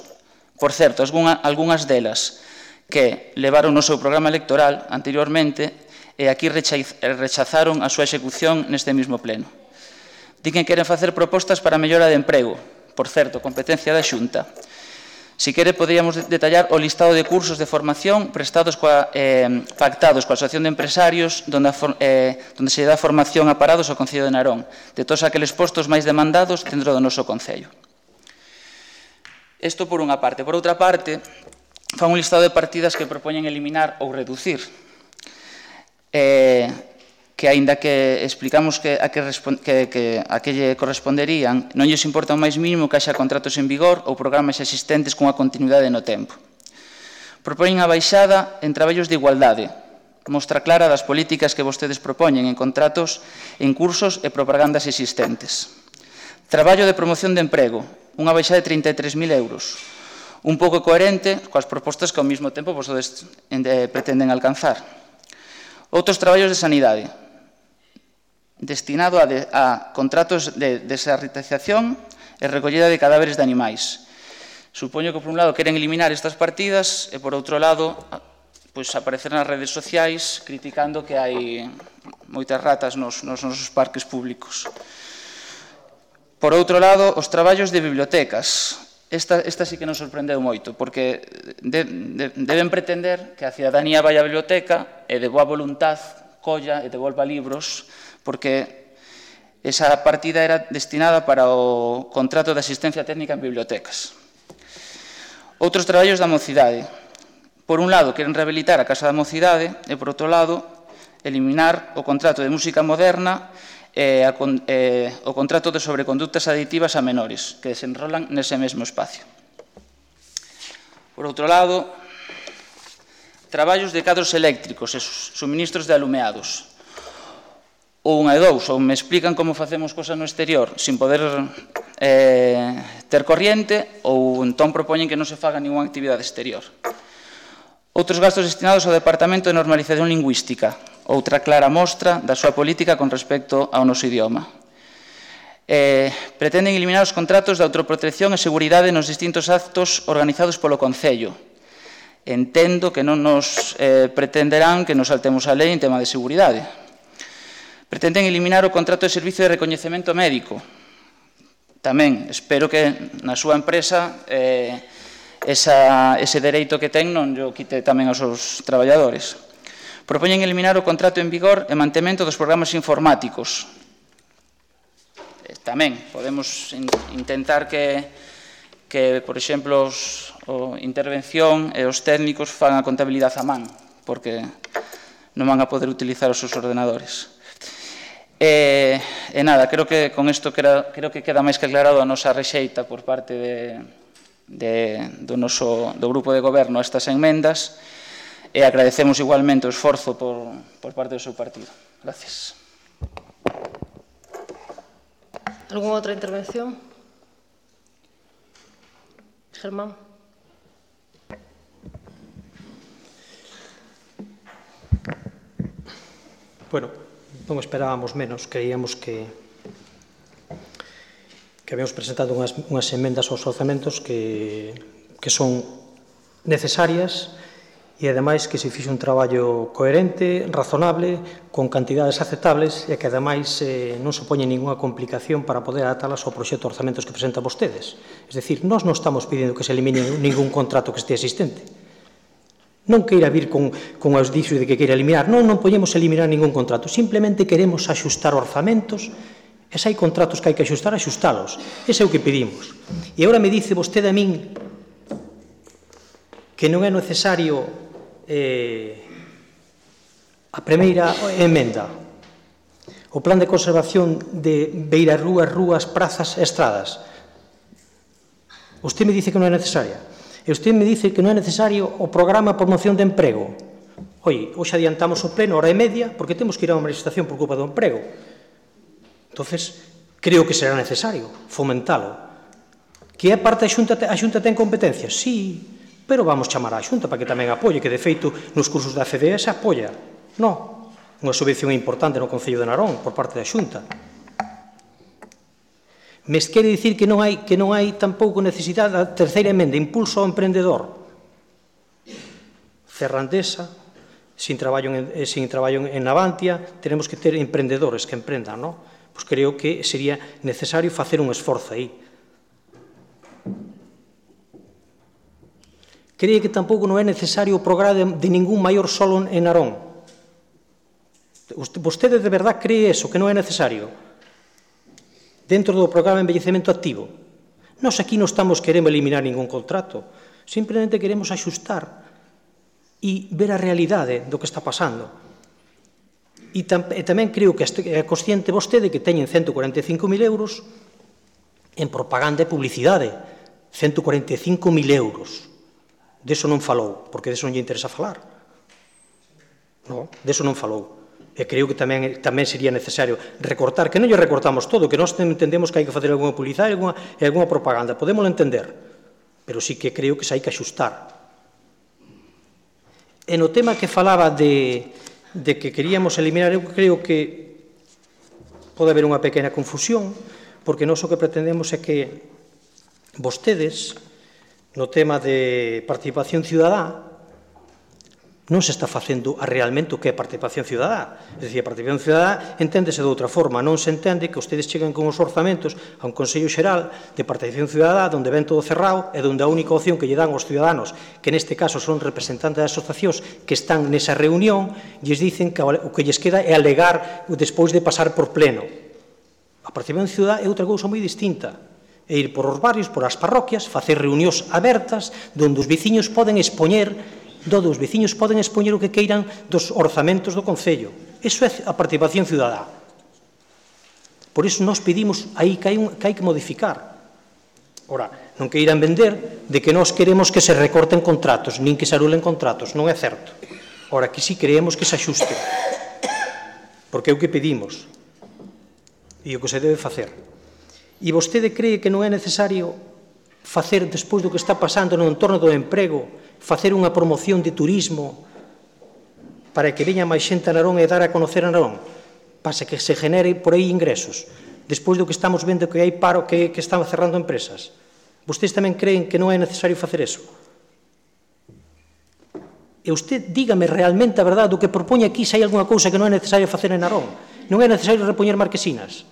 Por certo, algunhas delas que levaron no seu programa electoral anteriormente e aquí rechazaron a súa execución neste mesmo pleno. Di que queren facer propostas para a mellora de emprego, por certo, competencia da Xunta. Si quere, poderíamos detallar o listado de cursos de formación prestados coa, eh, pactados coa Asociación de Empresarios donde, eh, donde se dá formación a parados ao Concello de Narón, de todos aqueles postos máis demandados dentro do noso Concello. Isto por unha parte. Por outra parte, fan un listado de partidas que propoñen eliminar ou reducir. Eh, que aínda que explicamos que a que, que, que a que lle corresponderían, non lles importa o máis mínimo que haxa contratos en vigor ou programas existentes cunha continuidade no tempo. Propoñen a baixada en traballos de igualdade, mostra clara das políticas que vostedes propoñen en contratos, en cursos e propagandas existentes. Traballo de promoción de emprego, unha baixada de trinta e tres mil euros, un pouco coherente coas propostas que ao mesmo tempo vostedes pretenden alcanzar. Outros traballos de sanidade, destinado a, de, a contratos de desarretización e recollida de cadáveres de animais. Supoño que, por un lado, queren eliminar estas partidas e, por outro lado, pois, aparecer nas redes sociais criticando que hai moitas ratas nos, nos nosos parques públicos. Por outro lado, os traballos de bibliotecas. Esta, esta sí que nos sorprendeu moito, porque de, de, deben pretender que a cidadanía vai á biblioteca e de boa voluntad colla e devolva libros, porque esa partida era destinada para o contrato de asistencia técnica en bibliotecas. Outros traballos da mocidade. Por un lado, queren rehabilitar a Casa da Mocidade e, por outro lado, eliminar o contrato de música moderna e a, eh, o contrato de sobreconductas aditivas a menores, que desenrolan nese mesmo espacio. Por outro lado, traballos de cadros eléctricos e suministros de alumeados. Ou unha e dous, ou me explican como facemos cosas no exterior sin poder eh, ter corriente, ou entón propoñen que non se faga ninguna actividade exterior. Outros gastos destinados ao Departamento de Normalización Lingüística, outra clara mostra da súa política con respecto ao noso idioma. Eh, pretenden eliminar os contratos de autoprotección e seguridade nos distintos actos organizados polo Concello. Entendo que non nos eh, pretenderán que nos saltemos a lei en tema de seguridade. Pretenden eliminar o contrato de servicio de recoñecemento médico. Tamén espero que na súa empresa eh, esa, ese dereito que ten non o quite tamén aos seus traballadores. Propoñen eliminar o contrato en vigor e mantemento dos programas informáticos. Tamén podemos in, intentar que, que, por exemplo, os, o intervención e os técnicos fan a contabilidade a man, porque non van a poder utilizar os seus ordenadores. E, e nada, creo que con isto creo, creo que queda máis que aclarado a nosa rexeita por parte de, de, do, noso, do grupo de goberno a estas enmendas, e agradecemos igualmente o esforzo por, por parte do seu partido. Gracias. ¿Alguna outra intervención? Germán. Bueno, non esperábamos menos, creíamos que que habíamos presentado unhas, unhas emendas aos orzamentos que, que son necesarias e, ademais, que se fixe un traballo coherente, razonable, con cantidades aceptables e que, ademais, eh, non se poñe ninguna complicación para poder adaptalas ao proxecto de orzamentos que presentan vostedes. Es decir, nós non estamos pedindo que se elimine ningún contrato que este existente. Non queira vir con, con os dixos de que queira eliminar. Non, non poñemos eliminar ningún contrato. Simplemente queremos axustar orzamentos e se hai contratos que hai que axustar, axustalos. Ese é o que pedimos. E agora me dice vostede a min que non é necesario eh, a primeira emenda, o plan de conservación de beirarrúas, rúas, prazas e estradas. Usted me dice que non é necesaria. E usted me dice que non é necesario o programa de promoción de emprego. Oi, hoxe adiantamos o pleno, hora e media, porque temos que ir a unha manifestación por culpa do emprego. Entonces, creo que será necesario fomentalo. Que é parte da Xunta, a Xunta ten competencias? Sí, pero vamos chamar á Xunta para que tamén apoie, que de feito nos cursos da C D E se apoia. Non, unha subvención importante no Concello de Narón por parte da Xunta. Me quere dicir que non hai, que non hai tampouco necesidade da terceira emenda, impulso ao emprendedor. Ferrandesa, sin traballo en, sin traballo en Navantia, tenemos que ter emprendedores que emprendan, non? Pois creo que sería necesario facer un esforzo aí. Cree que tampouco non é necesario o programa de, de ningún maior solo en Narón. Vostede de verdad cree eso, que non é necesario? Dentro do programa de envellecemento activo. Nós aquí non estamos querendo eliminar ningún contrato, simplemente queremos axustar e ver a realidade do que está pasando. E, tam, e tamén creo que é consciente vostede que teñen ciento cuarenta e cinco mil euros en propaganda e publicidade. ciento cuarenta e cinco mil euros. Deso non falou, porque deso non lle interesa falar. Non, deso non falou. E creo que tamén, tamén sería necesario recortar, que non lle recortamos todo, que nós entendemos que hai que facer alguna publicidade e alguna, alguna propaganda, podémoslo entender, pero sí que creo que se hai que axustar. E no tema que falaba de, de que queríamos eliminar, eu creo que pode haber unha pequena confusión, porque nós o que pretendemos é que vostedes, no tema de participación ciudadá, non se está facendo realmente o que é participación cidadá. É dicir, a participación cidadá enténdese de outra forma, non se entende que ustedes cheguen con os orzamentos a un Consello Xeral de participación cidadá onde ven todo cerrado e onde a única opción que lle dan aos ciudadanos, que neste caso son representantes das asociacións que están nesa reunión, lles dicen que o que lles queda é alegar despois de pasar por pleno. A participación cidadá é outra cousa moi distinta. É ir por os barrios, por as parroquias, facer reunións abertas onde os veciños poden expoñer donde os veciños poden expoñer o que queiran dos orzamentos do Concello. Iso é a participación cidadá. Por iso nos pedimos aí que hai, un, que hai que modificar. Ora, non que irán vender de que nós queremos que se recorten contratos, nin que se anulen contratos, non é certo. Ora, que si creemos que se axuste. Porque é o que pedimos. E o que se debe facer. E vostede cree que non é necesario facer, despois do que está pasando no entorno do emprego, facer unha promoción de turismo para que veña máis xente a Narón e dar a conocer a Narón, para que se genere por aí ingresos, despois do que estamos vendo que hai paro, que, que están cerrando empresas. Vostedes tamén creen que non é necesario facer eso? E usted dígame realmente a verdade do que propone aquí, se hai alguna cousa que non é necesario facer en Narón. Non é necesario repoñer marquesinas.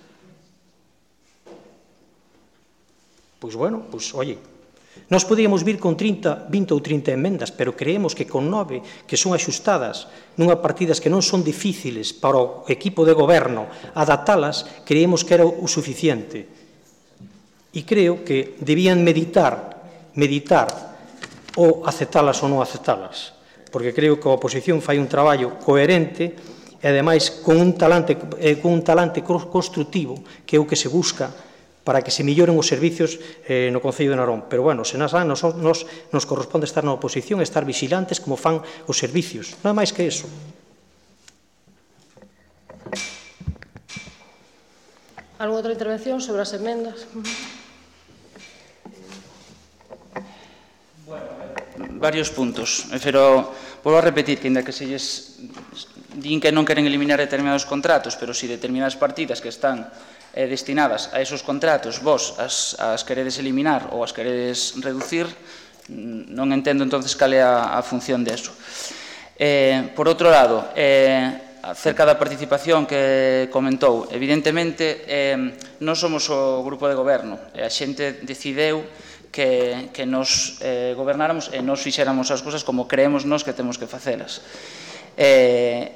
Pois bueno, pois, oye, nós podíamos vir con trinta, vinte ou trinta emendas, pero creemos que con nove, que son axustadas nunha partidas que non son difíciles para o equipo de goberno adaptalas, creemos que era o suficiente. E creo que debían meditar, meditar ou aceptalas ou non aceptalas, porque creo que a oposición fai un traballo coherente e, ademais, con un talante, eh, con un talante constructivo, que é o que se busca para que se melloren os servicios eh, no Concello de Narón. Pero, bueno, se nas, nos, nos, nos corresponde estar na oposición e estar vigilantes como fan os servicios. Non é máis que iso. Alguna outra intervención sobre as emendas? Bueno, varios puntos, pero volvo a repetir que, ainda que se lles din que non queren eliminar determinados contratos, pero si determinadas partidas que están eh, destinadas a esos contratos vos as, as queredes eliminar ou as queredes reducir, non entendo entonces cal é a, a función deso. Eh, por outro lado, eh, acerca da participación que comentou, evidentemente eh, non somos o grupo de goberno, e a xente decideu que, que nos eh, gobernáramos e nos fixéramos as cousas como creemos nós que temos que facelas. Eh,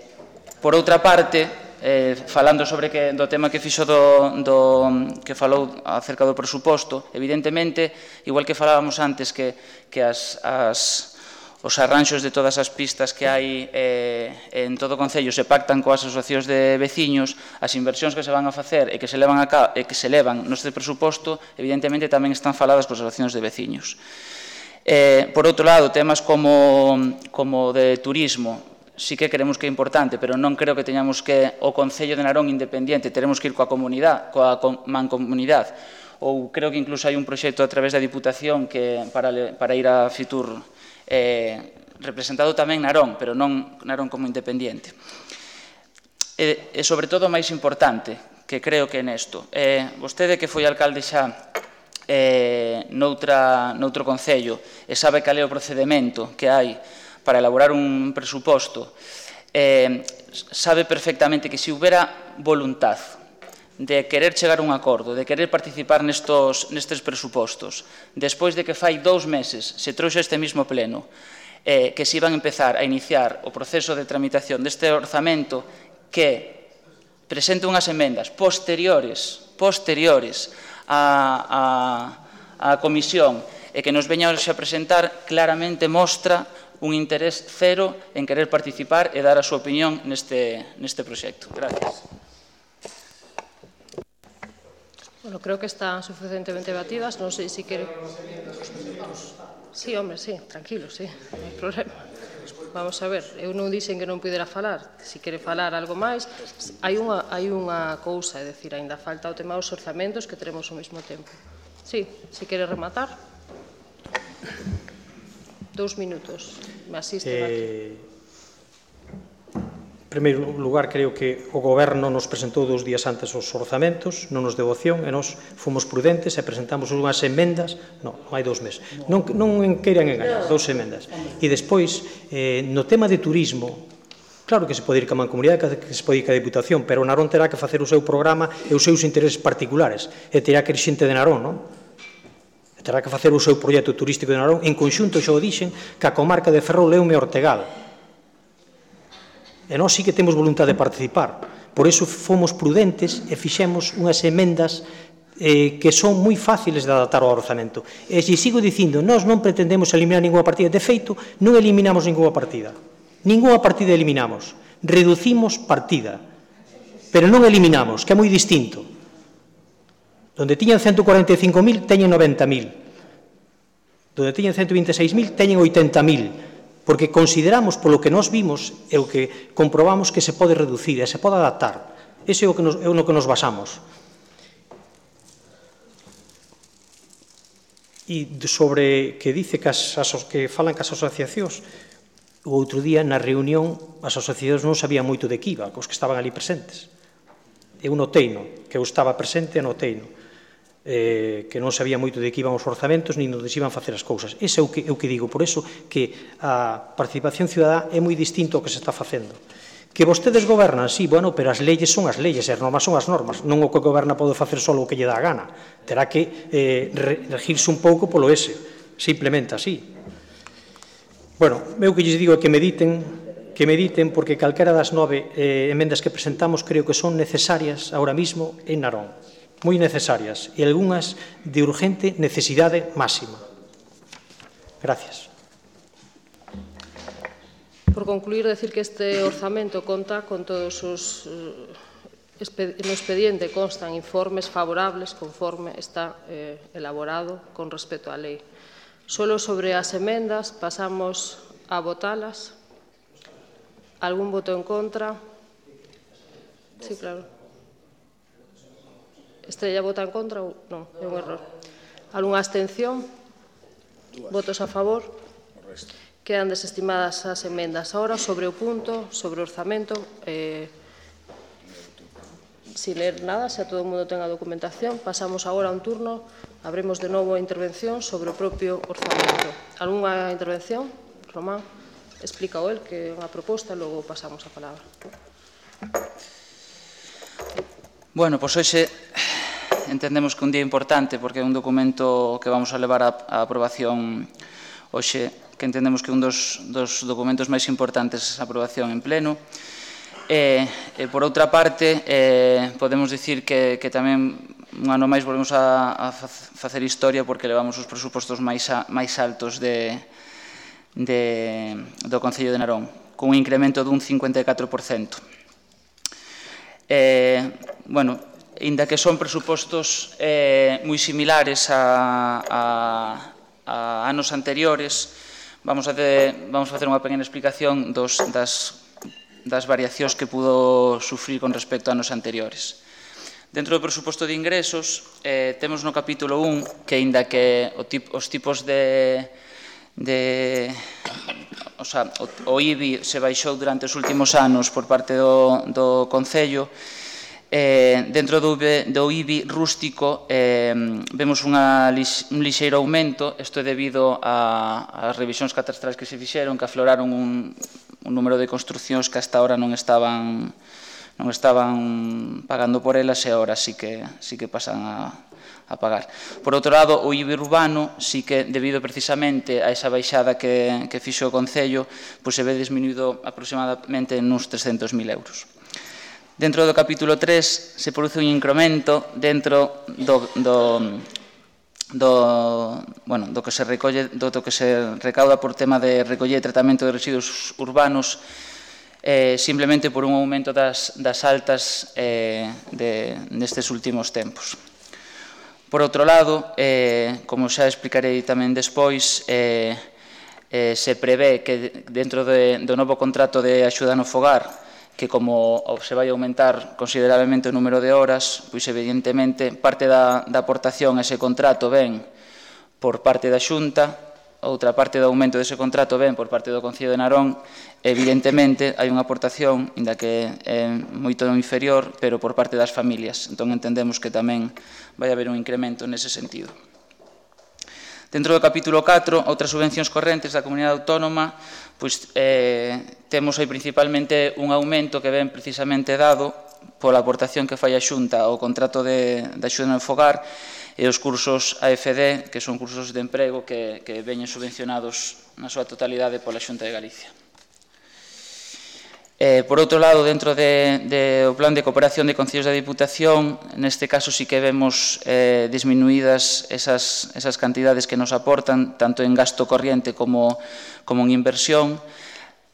por outra parte, Eh, falando sobre que, do tema que fixo do, do, que falou acerca do presuposto, evidentemente, igual que falábamos antes que, que as, as, os arranxos de todas as pistas que hai eh, en todo o Concello se pactan coas asociacións de veciños, as inversións que se van a facer e que se levan, a ca, e que se levan neste presuposto, evidentemente tamén están faladas coas asociacións de veciños. Eh, por outro lado, temas como, como de turismo, sí que creemos que é importante, pero non creo que teñamos que o Concello de Narón independiente, teremos que ir coa comunidade, coa mancomunidade, ou creo que incluso hai un proxecto a través da Diputación que para, para ir a Fitur eh, representado tamén Narón, pero non Narón como independiente. E, e sobre todo o máis importante, que creo que é nesto, eh, vostede que foi alcalde xa eh, noutra, noutro Concello e sabe cal é o procedimento que hai para elaborar un presuposto, eh, sabe perfectamente que se houbera voluntad de querer chegar a un acordo, de querer participar nestos, nestes presupostos, despois de que fai dous meses se trouxe este mismo pleno, eh, que se iban a empezar a iniciar o proceso de tramitación deste orzamento que presente unhas emendas posteriores, posteriores á, á, á comisión e que nos veña a presentar, claramente mostra un interés cero en querer participar e dar a súa opinión neste, neste proxecto. Gracias. Bueno, creo que están suficientemente batidas. Non sei se quere... Sí, hombre, sí, tranquilo, sí, non hai problema. Vamos a ver, eu non dixen que non pudera falar. Se quere falar algo máis, hai unha, hai unha cousa, é dicir, ainda falta o tema dos orzamentos que teremos ao mesmo tempo. Sí, se quere rematar. Dous minutos. Me asiste, eh, primeiro lugar, creo que o Goberno nos presentou dous días antes os orzamentos, non nos deu opción, e nos fomos prudentes e presentamos unhas emendas, non, non hai dous meses, non, non queiran engañar, dous emendas. E despois, eh, no tema de turismo, claro que se pode ir ca Mancomunidade, que se pode ir ca Diputación, pero o Narón terá que facer o seu programa e os seus intereses particulares, e terá que ir xente de Narón, non? Terá que facer o seu proxecto turístico de Narón en conxunto, xa o dixen, ca comarca de Ferrol, Leume e Ortegal. E nós sí que temos voluntade de participar. Por iso fomos prudentes e fixemos unhas emendas eh, que son moi fáciles de adaptar ao orzamento. E se sigo dicindo, nós non pretendemos eliminar ninguna partida. De feito, non eliminamos ninguna partida. Ninguna partida eliminamos. Reducimos partida. Pero non eliminamos, que é moi distinto. Donde tiñan ciento cuarenta e cinco mil, teñen noventa mil. Donde tiñan ciento vinte e seis mil, teñen oitenta mil. Porque consideramos, polo que nós vimos, e o que comprobamos que se pode reducir e se pode adaptar. Ese é o que nos, é no que nos basamos. E sobre que dice que, as, que falan que as asociacións, o outro día na reunión as asociacións non sabían moito de que iba, os que estaban ali presentes. Eu noteino, que eu estaba presente e noteino. Eh, que non sabía moito de que iban os orzamentos nin onde se iban facer as cousas. Ese é o que, é o que digo, por eso que a participación cidadá é moi distinto ao que se está facendo. Que vostedes gobernan, sí, bueno, pero as leyes son as leyes, as normas son as normas, non o que goberna pode facer só o que lle dá a gana. Terá que eh, regirse un pouco polo ese, simplemente así. Bueno, eu que lles digo é que mediten, que mediten, porque calquera das nove eh, emendas que presentamos creo que son necesarias ahora mismo en Narón. Moi necesarias e algunhas de urgente necesidade máxima. Gracias. Por concluir, decir que este orzamento conta con todos os... No expediente constan informes favorables conforme está eh, elaborado con respecto á lei. Solo sobre as emendas pasamos a votalas. Algún voto en contra? Sí, claro. Estrella vota en contra ou non? É un error. Algúnha abstención? Votos a favor? Quedan desestimadas as emendas. Ahora, sobre o punto, sobre o orzamento, eh, sin ler nada, se a todo o mundo ten a documentación, pasamos agora a un turno, abremos de novo a intervención sobre o propio orzamento. Algúnha intervención? Román, explica o el, que é unha proposta, logo pasamos a palabra. Bueno, pois hoxe entendemos que é un día importante porque é un documento que vamos a levar a aprobación hoxe, que entendemos que é un dos, dos documentos máis importantes a aprobación en pleno. E, e por outra parte, eh, podemos dicir que, que tamén un ano máis volvemos a, a facer historia porque levamos os presupostos máis, a, máis altos de, de, do Concello de Narón, con un incremento dun cincuenta e catro por cento. Eh, bueno, inda que son presupostos eh, moi similares a, a, a anos anteriores, vamos a, de, vamos a facer unha pequena explicación dos, das, das variacións que pudo sufrir con respecto a anos anteriores. Dentro do presuposto de ingresos, eh, temos no capítulo un que, inda que o tip, os tipos de... de o, sea, o, o I B I se baixou durante os últimos anos por parte do, do Concello, eh, dentro do, do I B I rústico eh, vemos unha, un lixeiro aumento. Isto é debido ás revisións catastrales que se fixeron, que afloraron un, un número de construcións que hasta ahora non estaban non estaban pagando por elas e agora sí que, sí que pasan a, a pagar. Por outro lado, o I B I urbano sí que, debido precisamente a esa baixada que, que fixo o Concello, pois se ve disminuído aproximadamente nuns trescentos mil euros. Dentro do capítulo tres se produce un incremento dentro do, do, do, bueno, do que se recolle, do, do que se recauda por tema de recoller e tratamento de residuos urbanos, eh, simplemente por un aumento das, das altas eh, de, nestes últimos tempos. Por outro lado, eh, como xa explicarei tamén despois, eh, eh, se prevé que dentro de, do novo contrato de axuda no fogar, que como se vai aumentar considerablemente o número de horas, pois evidentemente parte da, da aportación a ese contrato ven por parte da Xunta, outra parte do aumento dese contrato ven por parte do Concello de Narón, evidentemente hai unha aportación, inda que é moito inferior, pero por parte das familias. Entón entendemos que tamén vai haber un incremento nese sentido. Dentro do capítulo catro, outras subvencións correntes da comunidade autónoma, pois eh, temos aí principalmente un aumento que ven precisamente dado pola aportación que fai a Xunta ao contrato de, de axuda no fogar e os cursos A F D, que son cursos de emprego que, que veñen subvencionados na súa totalidade pola Xunta de Galicia. Eh, por outro lado, dentro de, de, do plan de cooperación de Concellos da Diputación, neste caso sí que vemos eh, disminuídas esas, esas cantidades que nos aportan, tanto en gasto corriente como, como en inversión,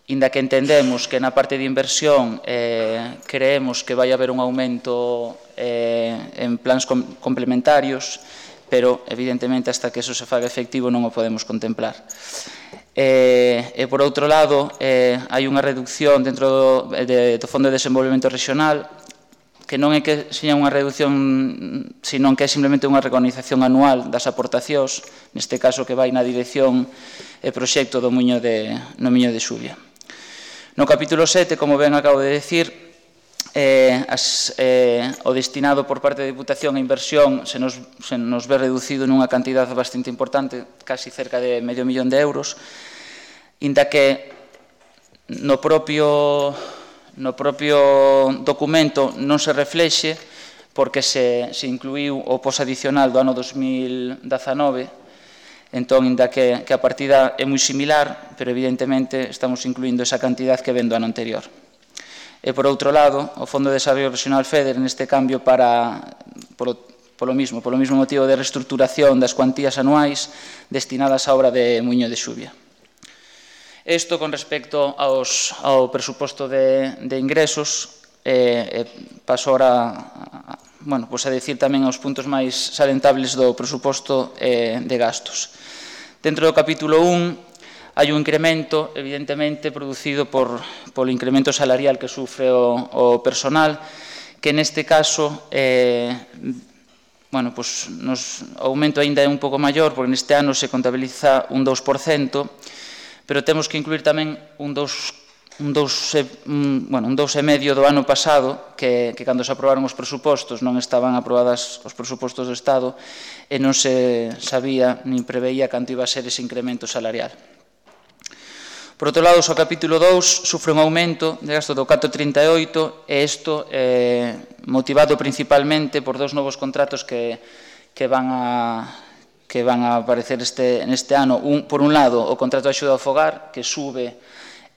inda que entendemos que na parte de inversión eh, creemos que vai haber un aumento eh, en plans com complementarios, pero evidentemente hasta que eso se faga efectivo non o podemos contemplar. E, e por outro lado, eh, hai unha reducción dentro do, de, do Fondo de Desenvolvemento Regional, que non é que seña unha reducción, sino que é simplemente unha recognización anual das aportacións, neste caso que vai na dirección e proxecto do Muiño de, no Miño de Xuvia. No capítulo sete, como ben acabo de decir, eh, as, eh, o destinado por parte da Diputación a inversión se nos, se nos ve reducido nunha cantidad bastante importante, casi cerca de medio millón de euros, inda que no propio, no propio documento non se reflexe porque se, se incluiu o posadicional do ano dos mil dezanove, entón, inda que, que a partida é moi similar, pero evidentemente estamos incluindo esa cantidad que ven do ano anterior. E, por outro lado, o Fondo de Desarrollo Regional FEDER, neste cambio para, polo, polo mismo, polo mismo motivo de reestructuración das cuantías anuais destinadas á obra de Muiño de Xuvia. Isto con respecto aos, ao presuposto de, de ingresos, eh, eh, paso ahora a, bueno, pues a decir tamén os puntos máis salentables do presuposto eh, de gastos. Dentro do capítulo un hai un incremento, evidentemente, producido por, polo incremento salarial que sufre o, o personal, que neste caso eh, bueno, pues nos, o aumento ainda é un pouco maior, porque neste ano se contabiliza un dous por cento, pero temos que incluir tamén un dous un dous, un, bueno, un dous e medio do ano pasado, que, que cando se aprobaron os presupostos non estaban aprobadas os presupostos do Estado e non se sabía nin preveía canto iba a ser ese incremento salarial. Por outro lado, o capítulo dous sufre un aumento de gasto do catro vírgula trinta e oito e isto eh, motivado principalmente por dous novos contratos que, que van a que van a aparecer este, neste ano. Un, por un lado, o contrato de axuda ao fogar, que sube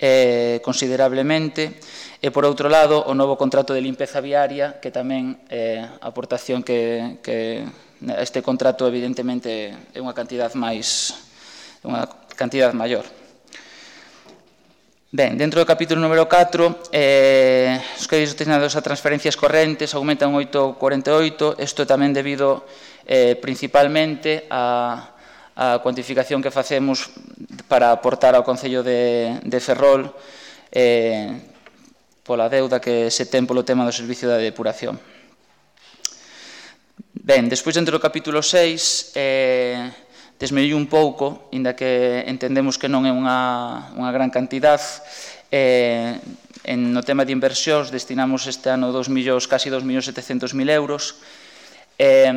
eh, considerablemente, e por outro lado, o novo contrato de limpeza viaria, que tamén é eh, a aportación que, que este contrato evidentemente é unha cantidad máis, unha cantidad maior. Ben, dentro do capítulo número catro, eh, os créditos destinados a transferencias correntes aumentan oito vírgula cuarenta e oito, isto tamén debido eh, principalmente a, a cuantificación que facemos para aportar ao Concello de, de Ferrol eh, pola deuda que se ten polo tema do servicio da depuración. Ben, despois dentro do capítulo seis, eh, desmediu un pouco, inda que entendemos que non é unha, unha gran cantidad. Eh, en, no tema de inversións destinamos este ano dos millóns, casi dos millóns setecentos mil euros. Eh,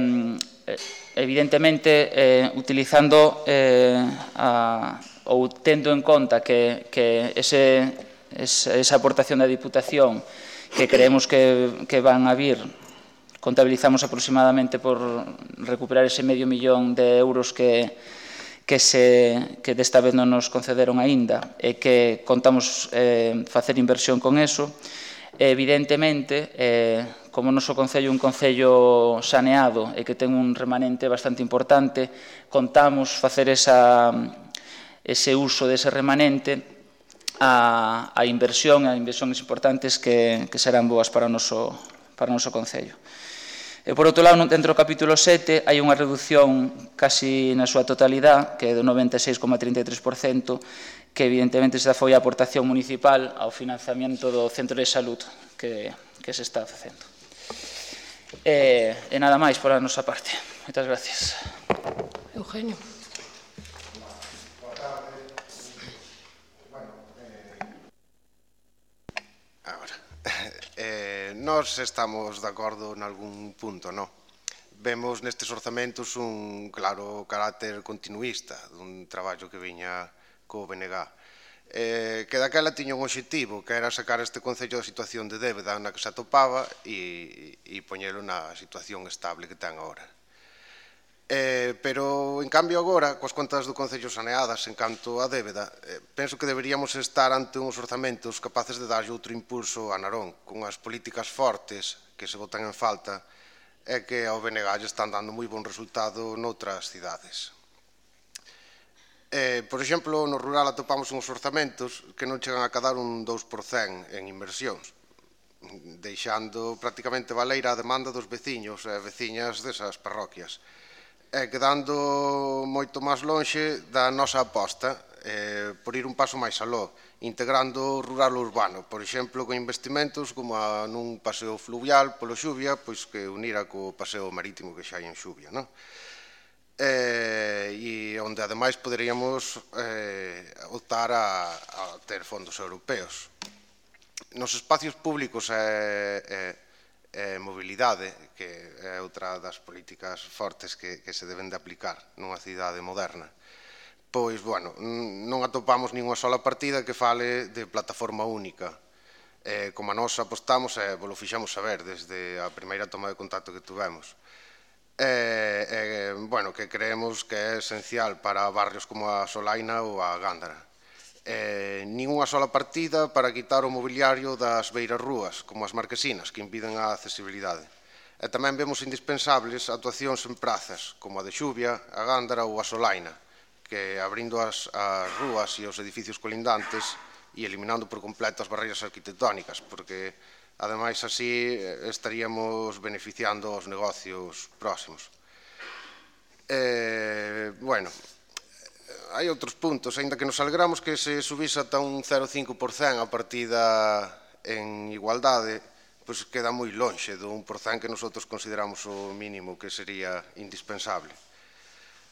evidentemente, eh, utilizando eh, a, ou tendo en conta que, que ese, ese, esa aportación da Diputación que creemos que, que van a vir, contabilizamos aproximadamente por recuperar ese medio millón de euros que, que, se, que desta vez non nos concederon aínda e que contamos eh, facer inversión con eso. Evidentemente, eh, como o noso Concello é un Concello saneado e que ten un remanente bastante importante, contamos facer esa, ese uso dese remanente a, a inversión, a inversións importantes que, que serán boas para o noso, para o noso Concello. E, por outro lado, dentro do capítulo sete, hai unha reducción casi na súa totalidade, que é do noventa e seis vírgula trinta e tres por cento, que evidentemente esta foi a aportación municipal ao financiamento do centro de salud que, que se está facendo. E, e nada máis por a nosa parte. Moitas gracias. Eugenio. nós estamos de acordo en algún punto, non? Vemos nestes orzamentos un claro carácter continuista dun traballo que viña co B N G. Eh, que daquela tiña un obxectivo, que era sacar este Concello da situación de débeda na que se atopaba e, e poñelo na situación estable que ten agora. Eh, pero, en cambio, agora, coas contas do Concello saneadas en canto a débeda, eh, penso que deberíamos estar ante uns orzamentos capaces de darlle outro impulso a Narón, con as políticas fortes que se botan en falta e que ao B N G lle están dando moi bon resultado noutras cidades. Eh, por exemplo, no rural atopamos uns orzamentos que non chegan a cadar un dous por cento en inversións, deixando prácticamente baleira a demanda dos veciños e veciñas desas parroquias, e quedando moito máis lonxe da nosa aposta eh, por ir un paso máis aló, integrando o rural urbano, por exemplo, con investimentos como a nun paseo fluvial polo Xuvia, pois que unira co paseo marítimo que xa hai en Xuvia, non? Eh, e onde ademais poderíamos eh, optar a, a ter fondos europeos. Nos espacios públicos e, e, e mobilidade, que é outra das políticas fortes que, que se deben de aplicar nunha cidade moderna, pois, bueno, non atopamos ninguna sola partida que fale de plataforma única. Eh, como a nós apostamos e vos lo fixamos saber desde a primeira toma de contacto que tuvemos. Eh, eh, bueno, que creemos que é esencial para barrios como a Solaina ou a Gándara. Eh, nin unha sola partida para quitar o mobiliario das beiras rúas, como as marquesinas, que impiden a accesibilidade. E tamén vemos indispensables actuacións en prazas, como a de Xuvia, a Gándara ou a Solaina, que abrindo as, as rúas e os edificios colindantes e eliminando por completo as barreiras arquitectónicas, porque ademais, así estaríamos beneficiando os negocios próximos. Eh, bueno, hai outros puntos, aínda que nos alegramos que se subise ata un cero coma cinco por cento a partida en igualdade, pois queda moi lonxe do un por cento que nosotros consideramos o mínimo que sería indispensable.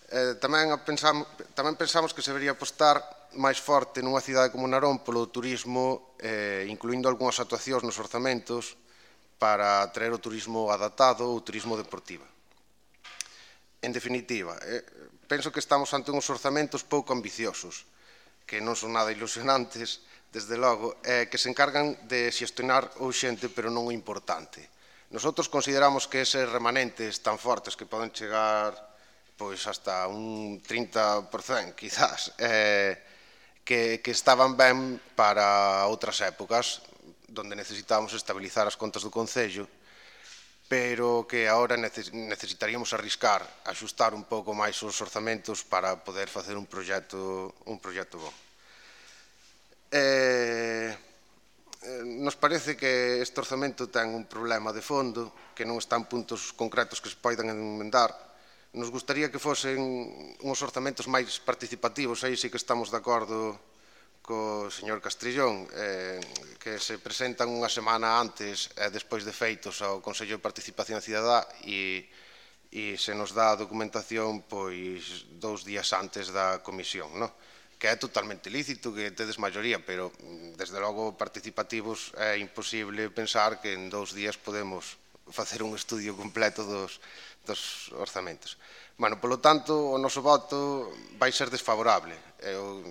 Eh, tamén, pensamos, tamén pensamos que se debería apostar máis forte nunha cidade como Narón polo turismo, eh, incluindo algunhas actuacións nos orzamentos para atraer o turismo adaptado ou turismo deportivo. En definitiva, eh, penso que estamos ante uns orzamentos pouco ambiciosos, que non son nada ilusionantes, desde logo, eh, que se encargan de xestionar o urxente, pero non o importante. Nosotros consideramos que eses remanentes tan fortes que poden chegar pois hasta un trinta por cento, quizás, eh, que, que estaban ben para outras épocas, donde necesitábamos estabilizar as contas do Concello, pero que agora necesitaríamos arriscar, axustar un pouco máis os orzamentos para poder facer un proxecto, un proxecto bon. Eh, nos parece que este orzamento ten un problema de fondo, que non está en puntos concretos que se poidan enmendar. Nos gustaría que fosen uns orzamentos máis participativos, aí sí que estamos de acordo co señor Castrillón, eh, que se presentan unha semana antes e despois de feitos ao Consello de Participación Cidadá e, e se nos dá a documentación pois dous días antes da comisión, no? Que é totalmente lícito que tedes maioría, pero desde logo participativos é imposible pensar que en dous días podemos facer un estudio completo dos, dos orzamentos. Bueno, polo tanto, o noso voto vai ser desfavorable. Eu,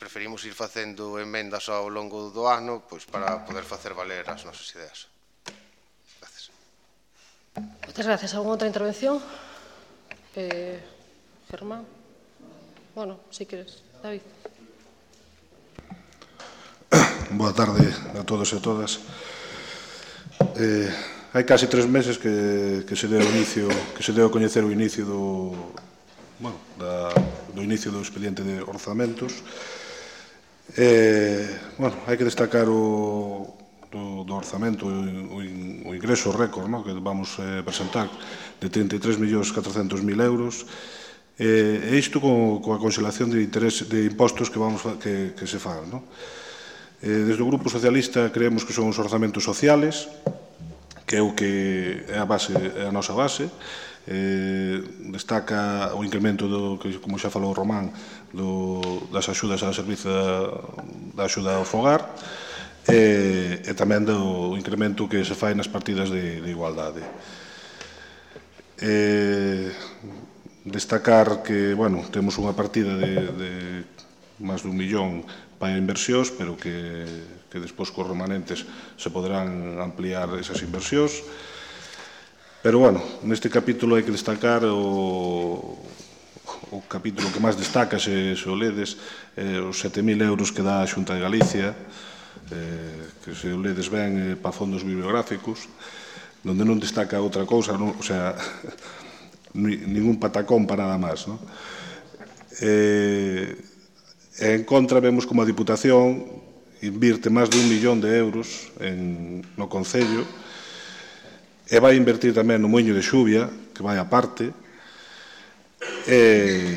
preferimos ir facendo emendas ao longo do ano pois, para poder facer valer as nosas ideas. Gracias. Moitas gracias. Alguna outra intervención? Eh, Germán? Bueno, si queres. David. Boa tarde a todos e a todas. Eh, hai casi tres meses que, que se deu inicio, que se deu a coñecer o inicio do, bueno, da, do inicio do expediente de orzamentos. Eh, bueno, hai que destacar o do, do orzamento o, o ingreso récord, no, que vamos eh, presentar de trinta e tres millóns catrocentos mil euros. E isto co, coa conxelación de, interés, de impostos que, vamos, que, que se fagan, no? Eh, desde o Grupo Socialista creemos que son os orzamentos sociales, que é o que é a base, é a nosa base. Eh, destaca o incremento do, que, como xa falou Román, do, das axudas ao servizo da, da axuda ao fogar. e, e tamén do incremento que se fai nas partidas de, de igualdade. Eh, destacar que, bueno, temos unha partida de, de máis dun millón para inversións, pero que, que despois cos remanentes se poderán ampliar esas inversións. Pero, bueno, neste capítulo hai que destacar o, o capítulo que máis destaca, se, se o ledes, eh, os sete mil euros que dá a Xunta de Galicia, eh, que se o ledes ben eh, para fondos bibliográficos, donde non destaca outra cousa, non, o sea, ningún patacón para nada máis, non? Eh, en contra vemos como a Diputación invirte máis de un millón de euros en, no Concello e vai invertir tamén no Moinho de Xuvia, que vai aparte, e,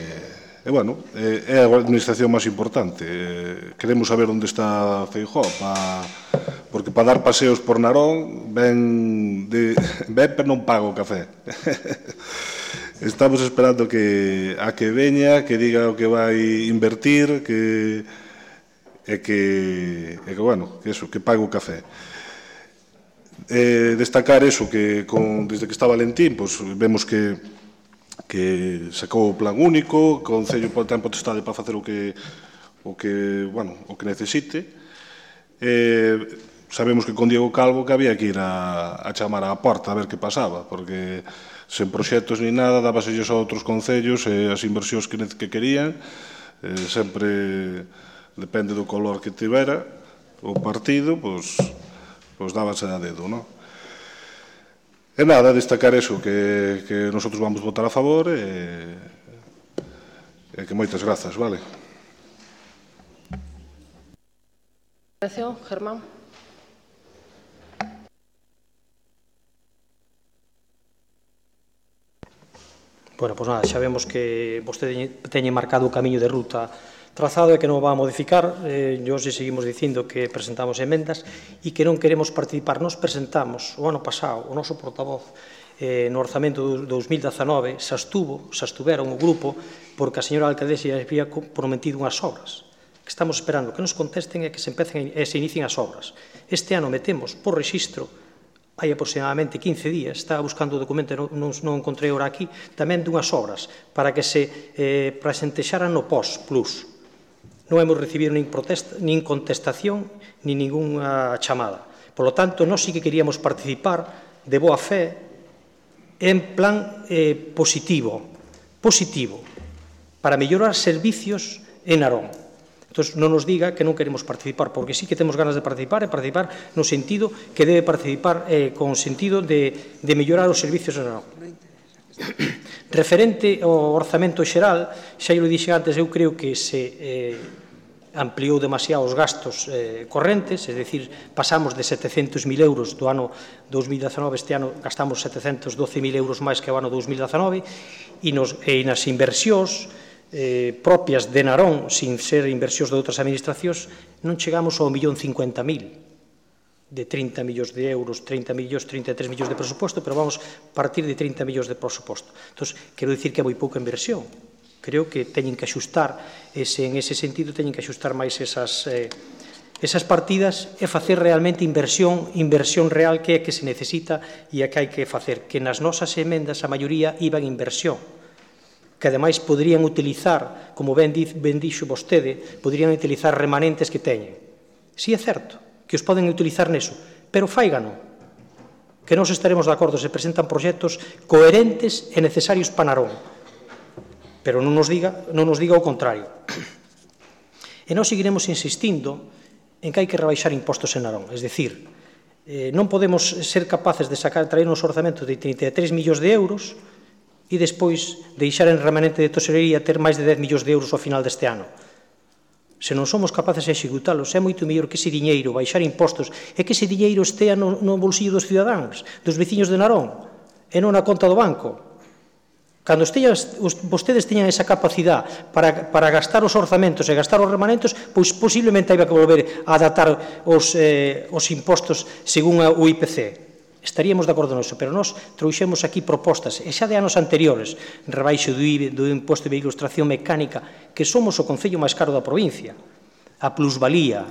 e bueno, é a administración máis importante. E, queremos saber onde está Feijóo, pa, porque para dar paseos por Narón ven, de, ven pero non paga o café. Estamos esperando que a que veña, que diga o que vai invertir, que e que, e que bueno, que eso, que pague o café. Eh, destacar eso, que con, desde que está Valentín, pues, vemos que que sacou o plan único, que o Concello ten potestade para facer o que o que, bueno, o que necesite. Eh, sabemos que con Diego Calvo que había que ir a, a chamar á porta a ver que pasaba, porque sen proxectos ni nada, dábasellos a outros concellos e as inversións que, que querían, eh, sempre depende do color que tivera o partido, pois, pois dábase a dedo, non? E nada, destacar eso, que, que nosotros vamos votar a favor e, e que moitas grazas, vale? Germán. Bueno, pois nada, xa vemos que vostede teñe marcado o camiño de ruta trazado e que non va a modificar. Eh, hoxe seguimos dicindo que presentamos emendas e que non queremos participar. Nos presentamos o ano pasado, o noso portavoz, eh, no orzamento do dos mil dezanove, xa estuvo, xa estuveron o grupo, porque a señora alcaldesa había prometido unhas obras. Que estamos esperando que nos contesten e que se empecen e se inicien as obras. Este ano metemos por rexistro, hai aproximadamente quince días, estaba buscando o documento e non, non, non encontrei ora aquí, tamén dunhas obras para que se eh, presentexaran no P O S Plus. Non hemos recibido nin, protesta, nin contestación nin ninguna chamada. Por lo tanto, nós sí que queríamos participar de boa fe en plan eh, positivo, positivo, para mellorar servicios en Narón. Entón, non nos diga que non queremos participar, porque sí que temos ganas de participar, e participar no sentido que debe participar eh, con sentido de, de mellorar os servicios en Narón. Referente ao orzamento xeral, xa eu dixen antes, eu creo que se eh, ampliou demasiado os gastos eh, correntes, é dicir, pasamos de setecentos mil euros do ano dos mil dezanove, este ano gastamos setecentos doce mil euros máis que o ano dos mil dezanove, e, nos, e nas inversións eh, propias de Narón, sin ser inversións de outras administracións, non chegamos ao millón cincuenta mil, de trinta millóns de euros, trinta millóns, trinta e tres millóns de presuposto, pero vamos partir de trinta millóns de presuposto. Entón, quero dicir que é moi pouca inversión. Creo que teñen que axustar, ese, en ese sentido, teñen que axustar máis esas, eh, esas partidas e facer realmente inversión, inversión real que é que se necesita e a que hai que facer. Que nas nosas emendas, a maioría, iban inversión, que ademais poderían utilizar, como ben, ben dixo vostede, poderían utilizar remanentes que teñen. Si é certo que os poden utilizar neso, pero faigano, que nós estaremos de acordo se presentan proxectos coherentes e necesarios para Narón, pero non nos diga, non nos diga o contrario. E nós seguiremos insistindo en que hai que rebaixar impostos en Narón, es dicir, eh, non podemos ser capaces de sacar, traer uns orzamentos de trinta e tres millóns de euros e despois deixar en remanente de tesorería ter máis de dez millóns de euros ao final deste ano. Se non somos capaces de executalos, é moito mellor que ese diñeiro, baixar impostos, e que ese diñeiro estea no, no bolsillo dos cidadáns, dos veciños de Narón, e non na conta do banco. Cando esteas, os, vostedes teñan esa capacidade para, para gastar os orzamentos e gastar os remanentes, pois posiblemente haiba que volver a adaptar os, eh, os impostos según o I P C. Estaríamos de acordo nisso, pero nós trouxemos aquí propostas, e xa de anos anteriores, rebaixo do I B E, do imposto de ilustración mecánica, que somos o concello máis caro da provincia, a plusvalía,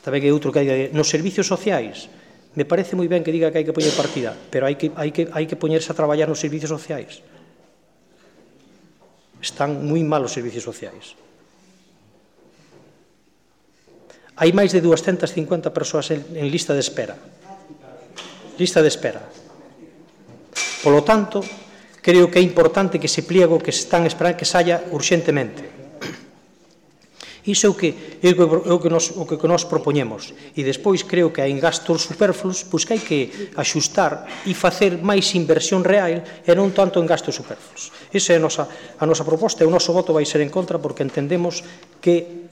tamén hai outro que hai nos servicios sociais. Me parece moi ben que diga que hai que poñer partida, pero hai que, hai que, hai que poñerse a traballar nos servicios sociais. Están moi mal os servicios sociais. Hai máis de dúascentas cincuenta persoas en, en lista de espera. Lista de espera. Polo tanto, creo que é importante que ese pliego que se están esperando que saia urxentemente. Iso é o que, é o que, nos, o que nos propoñemos. E despois creo que hai gastos superfluos, pois que hai que axustar e facer máis inversión real e non tanto en gastos superfluos. Esa é a nosa, a nosa proposta e o noso voto vai ser en contra porque entendemos que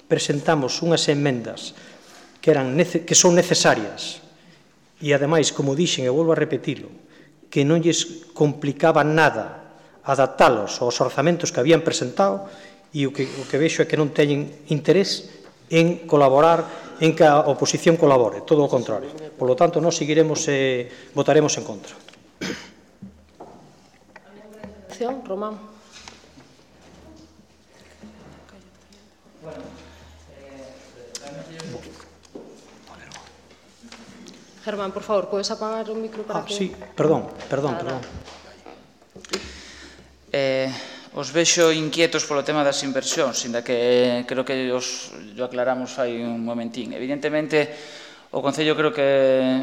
presentamos unhas emendas que, eran, que son necesarias e, ademais, como dixen, e volvo a repetilo, que non lles complicaba nada adaptalos aos orzamentos que habían presentado e o que, o que vexo é que non teñen interés en colaborar, en que a oposición colabore, todo o contrario. Por lo tanto, nós seguiremos e eh, votaremos en contra. Román. Germán, por favor, podes apagar o micro para ah, que... Sí, perdón, perdón, perdón. Eh... Os vexo inquietos polo tema das inversións, inda que creo que os lo aclaramos fai un momentín. Evidentemente, o Concello creo que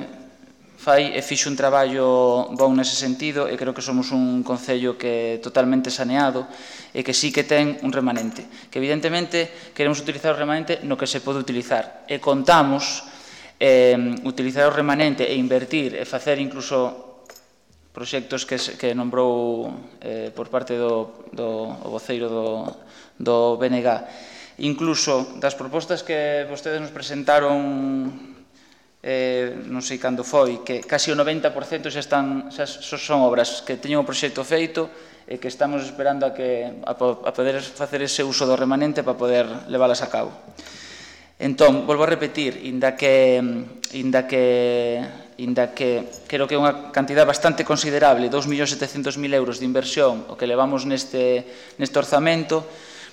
fai e fixo un traballo bon nese sentido e creo que somos un Concello que é totalmente saneado e que sí que ten un remanente. Que evidentemente queremos utilizar o remanente no que se pode utilizar e contamos eh, utilizar o remanente e invertir e facer incluso proxectos que, que nombrou eh, por parte do, do o voceiro do, do B N G. Incluso das propostas que vostedes nos presentaron, eh, non sei cando foi, que casi o noventa por cento xa, están, xa son obras que teñen o proxecto feito e que estamos esperando a, que, a, a poder facer ese uso do remanente para poder leválas a cabo. Entón, volvo a repetir, inda que... Inda que inda que creo que é unha cantidad bastante considerable, dous millóns setecentos mil euros de inversión, o que levamos neste, neste orzamento,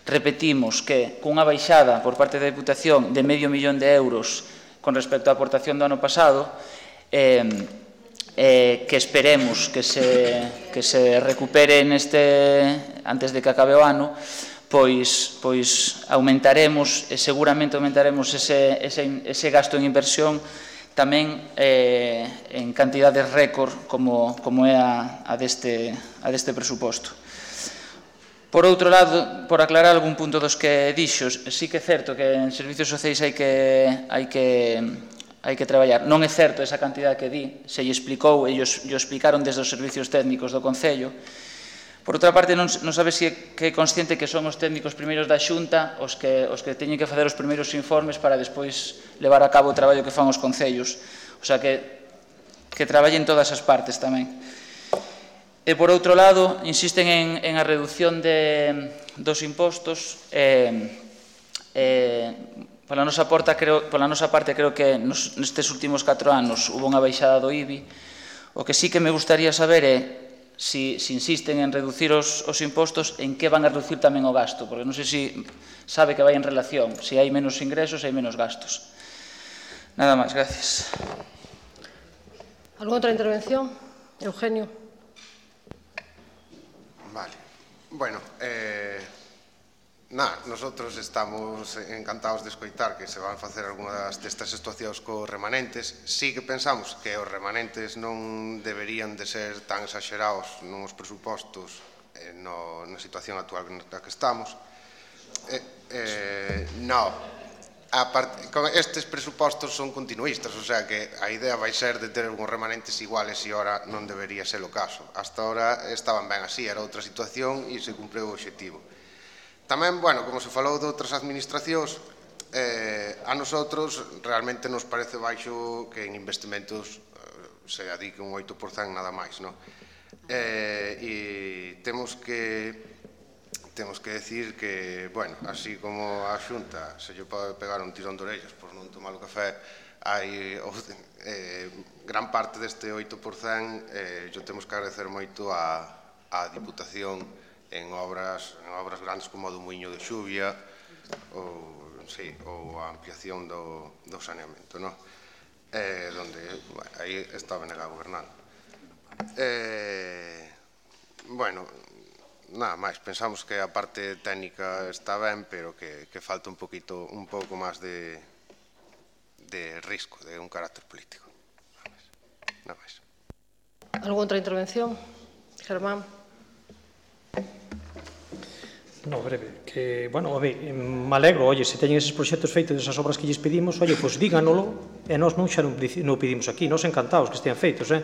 repetimos que cunha baixada por parte da Deputación de medio millón de euros con respecto á aportación do ano pasado, eh, eh, que esperemos que se, que se recupere neste, antes de que acabe o ano, pois, pois aumentaremos, e seguramente aumentaremos ese, ese, ese gasto en inversión tamén eh, en cantidades récord como, como é a, a, deste, a deste presuposto. Por outro lado, por aclarar algún punto dos que dixos, sí que é certo que en servicios sociais hai que, hai que, hai que traballar. Non é certo esa cantidad que di, se lle explicou, ellos lle explicaron desde os servicios técnicos do Concello. Por outra parte, non, non sabe se que é consciente que son os técnicos primeiros da Xunta os que, os que teñen que facer os primeiros informes para despois levar a cabo o traballo que fan os concellos. O sea, que, que traballen todas as partes tamén. E, por outro lado, insisten en, en a reducción de, dos impostos. Eh, eh, pola, nosa porta, creo, pola nosa parte, creo que nos, nestes últimos catro anos hubo unha baixada do I B I. O que sí que me gustaría saber é Si, si insisten en reducir os, os impostos, en que van a reducir tamén o gasto, porque non sei se sabe que vai en relación, se hai menos ingresos, hai menos gastos. Nada máis, gracias. ¿Alguna outra intervención? Eugenio. Vale. Bueno, eh, na, nosotros estamos encantados de escoitar que se van facer algunhas destas situacións cos remanentes. Sí que pensamos que os remanentes non deberían de ser tan exagerados nos presupostos eh, no, na situación actual na que estamos. Eh, eh, no, a part, con estes presupostos son continuistas, o sea que a idea vai ser de ter uns remanentes iguales e ora non debería ser o caso. Hasta ora estaban ben así, era outra situación e se cumpreu o obxectivo. Tamén, bueno, como se falou de outras administracións, eh, a nosotros realmente nos parece baixo que en investimentos eh, se adique un oito por cento nada máis, non? Eh, e temos que temos que decir que, bueno, así como a Xunta se lle pode pegar un tirón de orellas por non tomar o café, hai eh, gran parte deste oito por cento eh, yo temos que agradecer moito á, á Diputación en obras, en obras grandes como o do Muiño de Xuvia ou sí, ou a ampliación do, do saneamento, non? Eh, donde, bueno, aí está B N G gobernando. Eh, bueno, nada máis, pensamos que a parte técnica está ben, pero que, que falta un poquito, un pouco máis de, de risco, de un carácter político. Nada máis. ¿Alguna outra intervención? Germán. No, breve, que, bueno, a ver, me alegro, oye, se teñen eses proxectos feitos desas obras que lles pedimos, oye, pois díganolo, e nós non xa non o pedimos aquí, nós encantados que estean feitos, eh?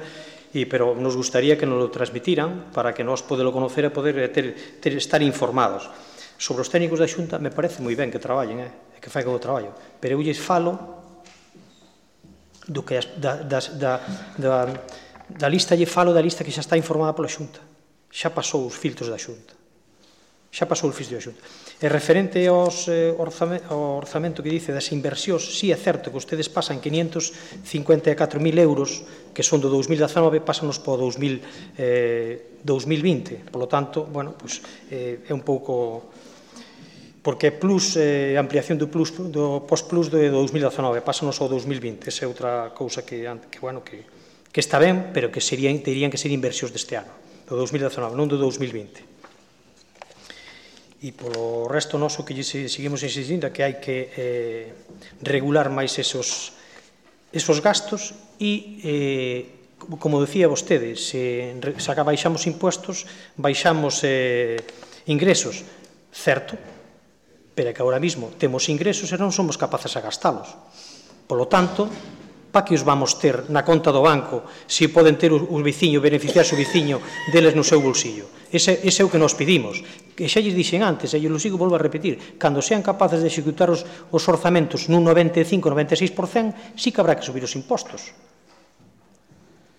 E, pero nos gustaría que nos lo transmitiran para que nós podelo conocer e poder ter, ter, estar informados. Sobre os técnicos da Xunta, me parece moi ben que traballen, eh? E que faigan o traballo, pero eu lles falo do que da, da, da, da, da lista, lle falo da lista que xa está informada pola Xunta, xa pasou os filtros da Xunta. Xa pasou o filtro da Xunta. E referente aos, eh, orzamento, ao orzamento que dice das inversións, sí é certo que ustedes pasan quinientos cincuenta e catro mil euros, que son do dous mil dezanove, pásanos para o dous mil vinte. Por lo tanto, bueno, pues, eh, é un pouco... Porque é plus, eh, ampliación do, plus, do post-plus do dous mil dezanove, pásanos ao dous mil vinte. Esa é outra cousa que, que, bueno, que, que está ben, pero que serían, terían que ser inversións deste ano, do dous mil dezanove, non do dous mil vinte. E polo resto noso que seguimos insistindo é que hai que eh, regular máis esos, esos gastos e, eh, como decía vostede, se, se baixamos impuestos, baixamos eh, ingresos, certo, pero é que agora mismo temos ingresos e non somos capaces a gastalos. Polo tanto, para que os vamos ter na conta do banco se poden ter o veciño, beneficiarse o veciño deles no seu bolsillo? Ese, ese é o que nos pedimos. Que xa lles dixen antes, e eu lo sigo, volvo a repetir, cando sean capaces de executar os, os orzamentos nun noventa e cinco a noventa e seis por cento, sí que habrá que subir os impostos.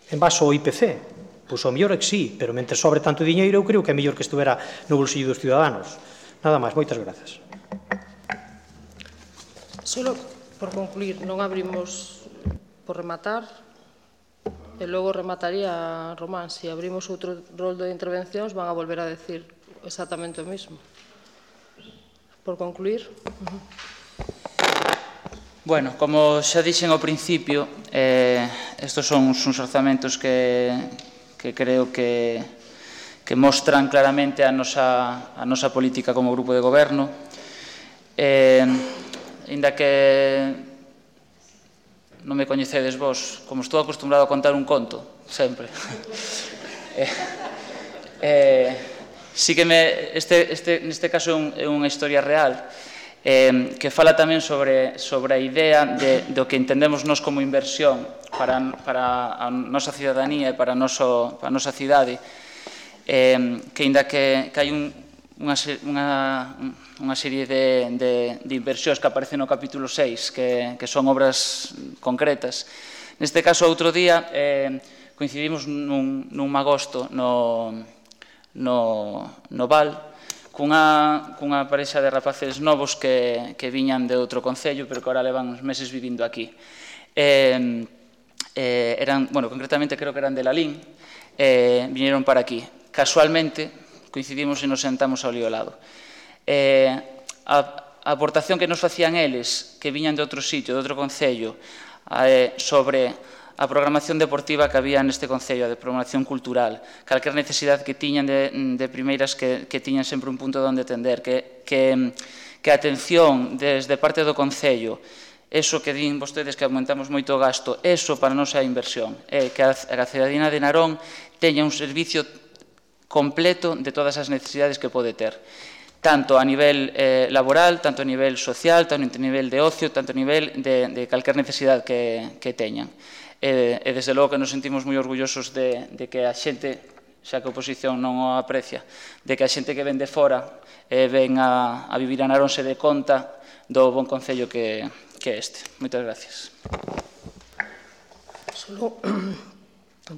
En base ao I P C, pois o mellor é que sí, pero mentre sobre tanto diñeiro, eu creo que é mellor que estuvera no bolsillo dos ciudadanos. Nada máis, moitas grazas. Solo por concluir, non abrimos por rematar, e logo remataría Román. Se abrimos outro roldo de intervencións, van a volver a decir exactamente o mismo. Por concluir. Uh-huh. Bueno, como xa dixen ao principio, eh, estos son uns orzamentos que, que creo que, que mostran claramente a nosa, a nosa política como grupo de goberno. Eh, ainda que non me coñecedes vos, como estou acostumbrado a contar un conto, sempre. eh, eh, sí que me, este, este, neste caso é, un, é unha historia real, eh, que fala tamén sobre, sobre a idea de, do que entendemos nós como inversión para, para a nosa cidadanía e para a, noso, para a nosa cidade, eh, que ainda que, que hai un, unha, unha, unha serie de, de, de inversións que aparecen no capítulo seis, que, que son obras concretas. Neste caso, outro día, eh, coincidimos nun, nun magosto no, no, no Val, cunha, cunha parexa de rapaces novos que, que viñan de outro concello, pero que ahora levan uns meses vivindo aquí. Eh, eh, eran, bueno, concretamente creo que eran de Lalín, eh, viñeron para aquí. Casualmente, coincidimos e nos sentamos ao lío lado. Eh, a, a aportación que nos facían eles, que viñan de outro sitio, de outro concello, eh, sobre a programación deportiva que había neste concello, de programación cultural, calquer necesidade que tiñan de, de primeiras que, que tiñan sempre un punto onde atender, que, que, que a atención desde parte do concello, eso que din vostedes que aumentamos moito o gasto, eso para nós é a inversión, é que a, a cidadina de Narón teña un servicio completo de todas as necesidades que pode ter, tanto a nivel eh, laboral, tanto a nivel social, tanto a nivel de ocio, tanto a nivel de, de calquer necesidade que, que teñan. E, e desde logo que nos sentimos moi orgullosos de, de que a xente, xa que a oposición non o aprecia, de que a xente que ven de fora eh, ven a, a vivir a Narón se dé conta do bon concello que, que é este. Moitas gracias. Solo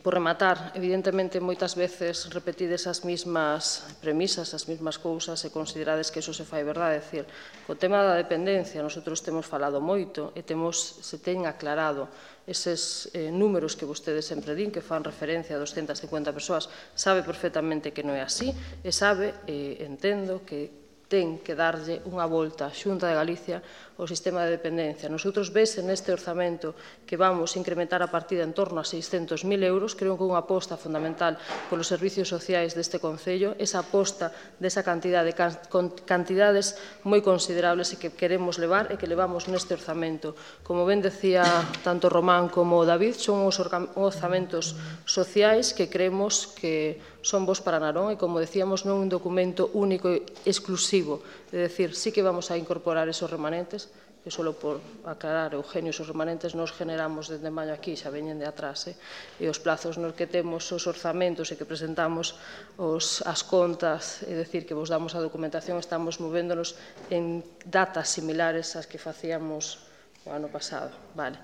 por rematar, evidentemente moitas veces repetides as mesmas premisas, as mesmas cousas e considerades que eso se fai verdade. É dicir, co tema da dependencia, nosotros temos falado moito e temos, se ten aclarado eses eh, números que vostedes sempre din, que fan referencia a doscientas cincuenta persoas, sabe perfectamente que non é así e sabe, eh, entendo, que ten que darlle unha volta a Xunta de Galicia ao sistema de dependencia. Nosotros vese neste orzamento que vamos incrementar a partida en torno a seiscentos mil euros, creo que unha aposta fundamental polos servicios sociais deste Concello, esa aposta desa cantidade, con cantidades moi considerables e que queremos levar e que levamos neste orzamento. Como ben decía tanto Román como David, son os orzamentos sociais que creemos que son vos para Narón e, como decíamos, non un documento único e exclusivo. É dicir, sí que vamos a incorporar esos remanentes, que só por aclarar, Eugenio, esos remanentes nos generamos desde maio aquí, xa veñen de atrás, eh? E os plazos nos que temos os orzamentos e que presentamos os, as contas, é dicir, que vos damos a documentación, estamos movéndonos en datas similares ás que facíamos o ano pasado. Vale.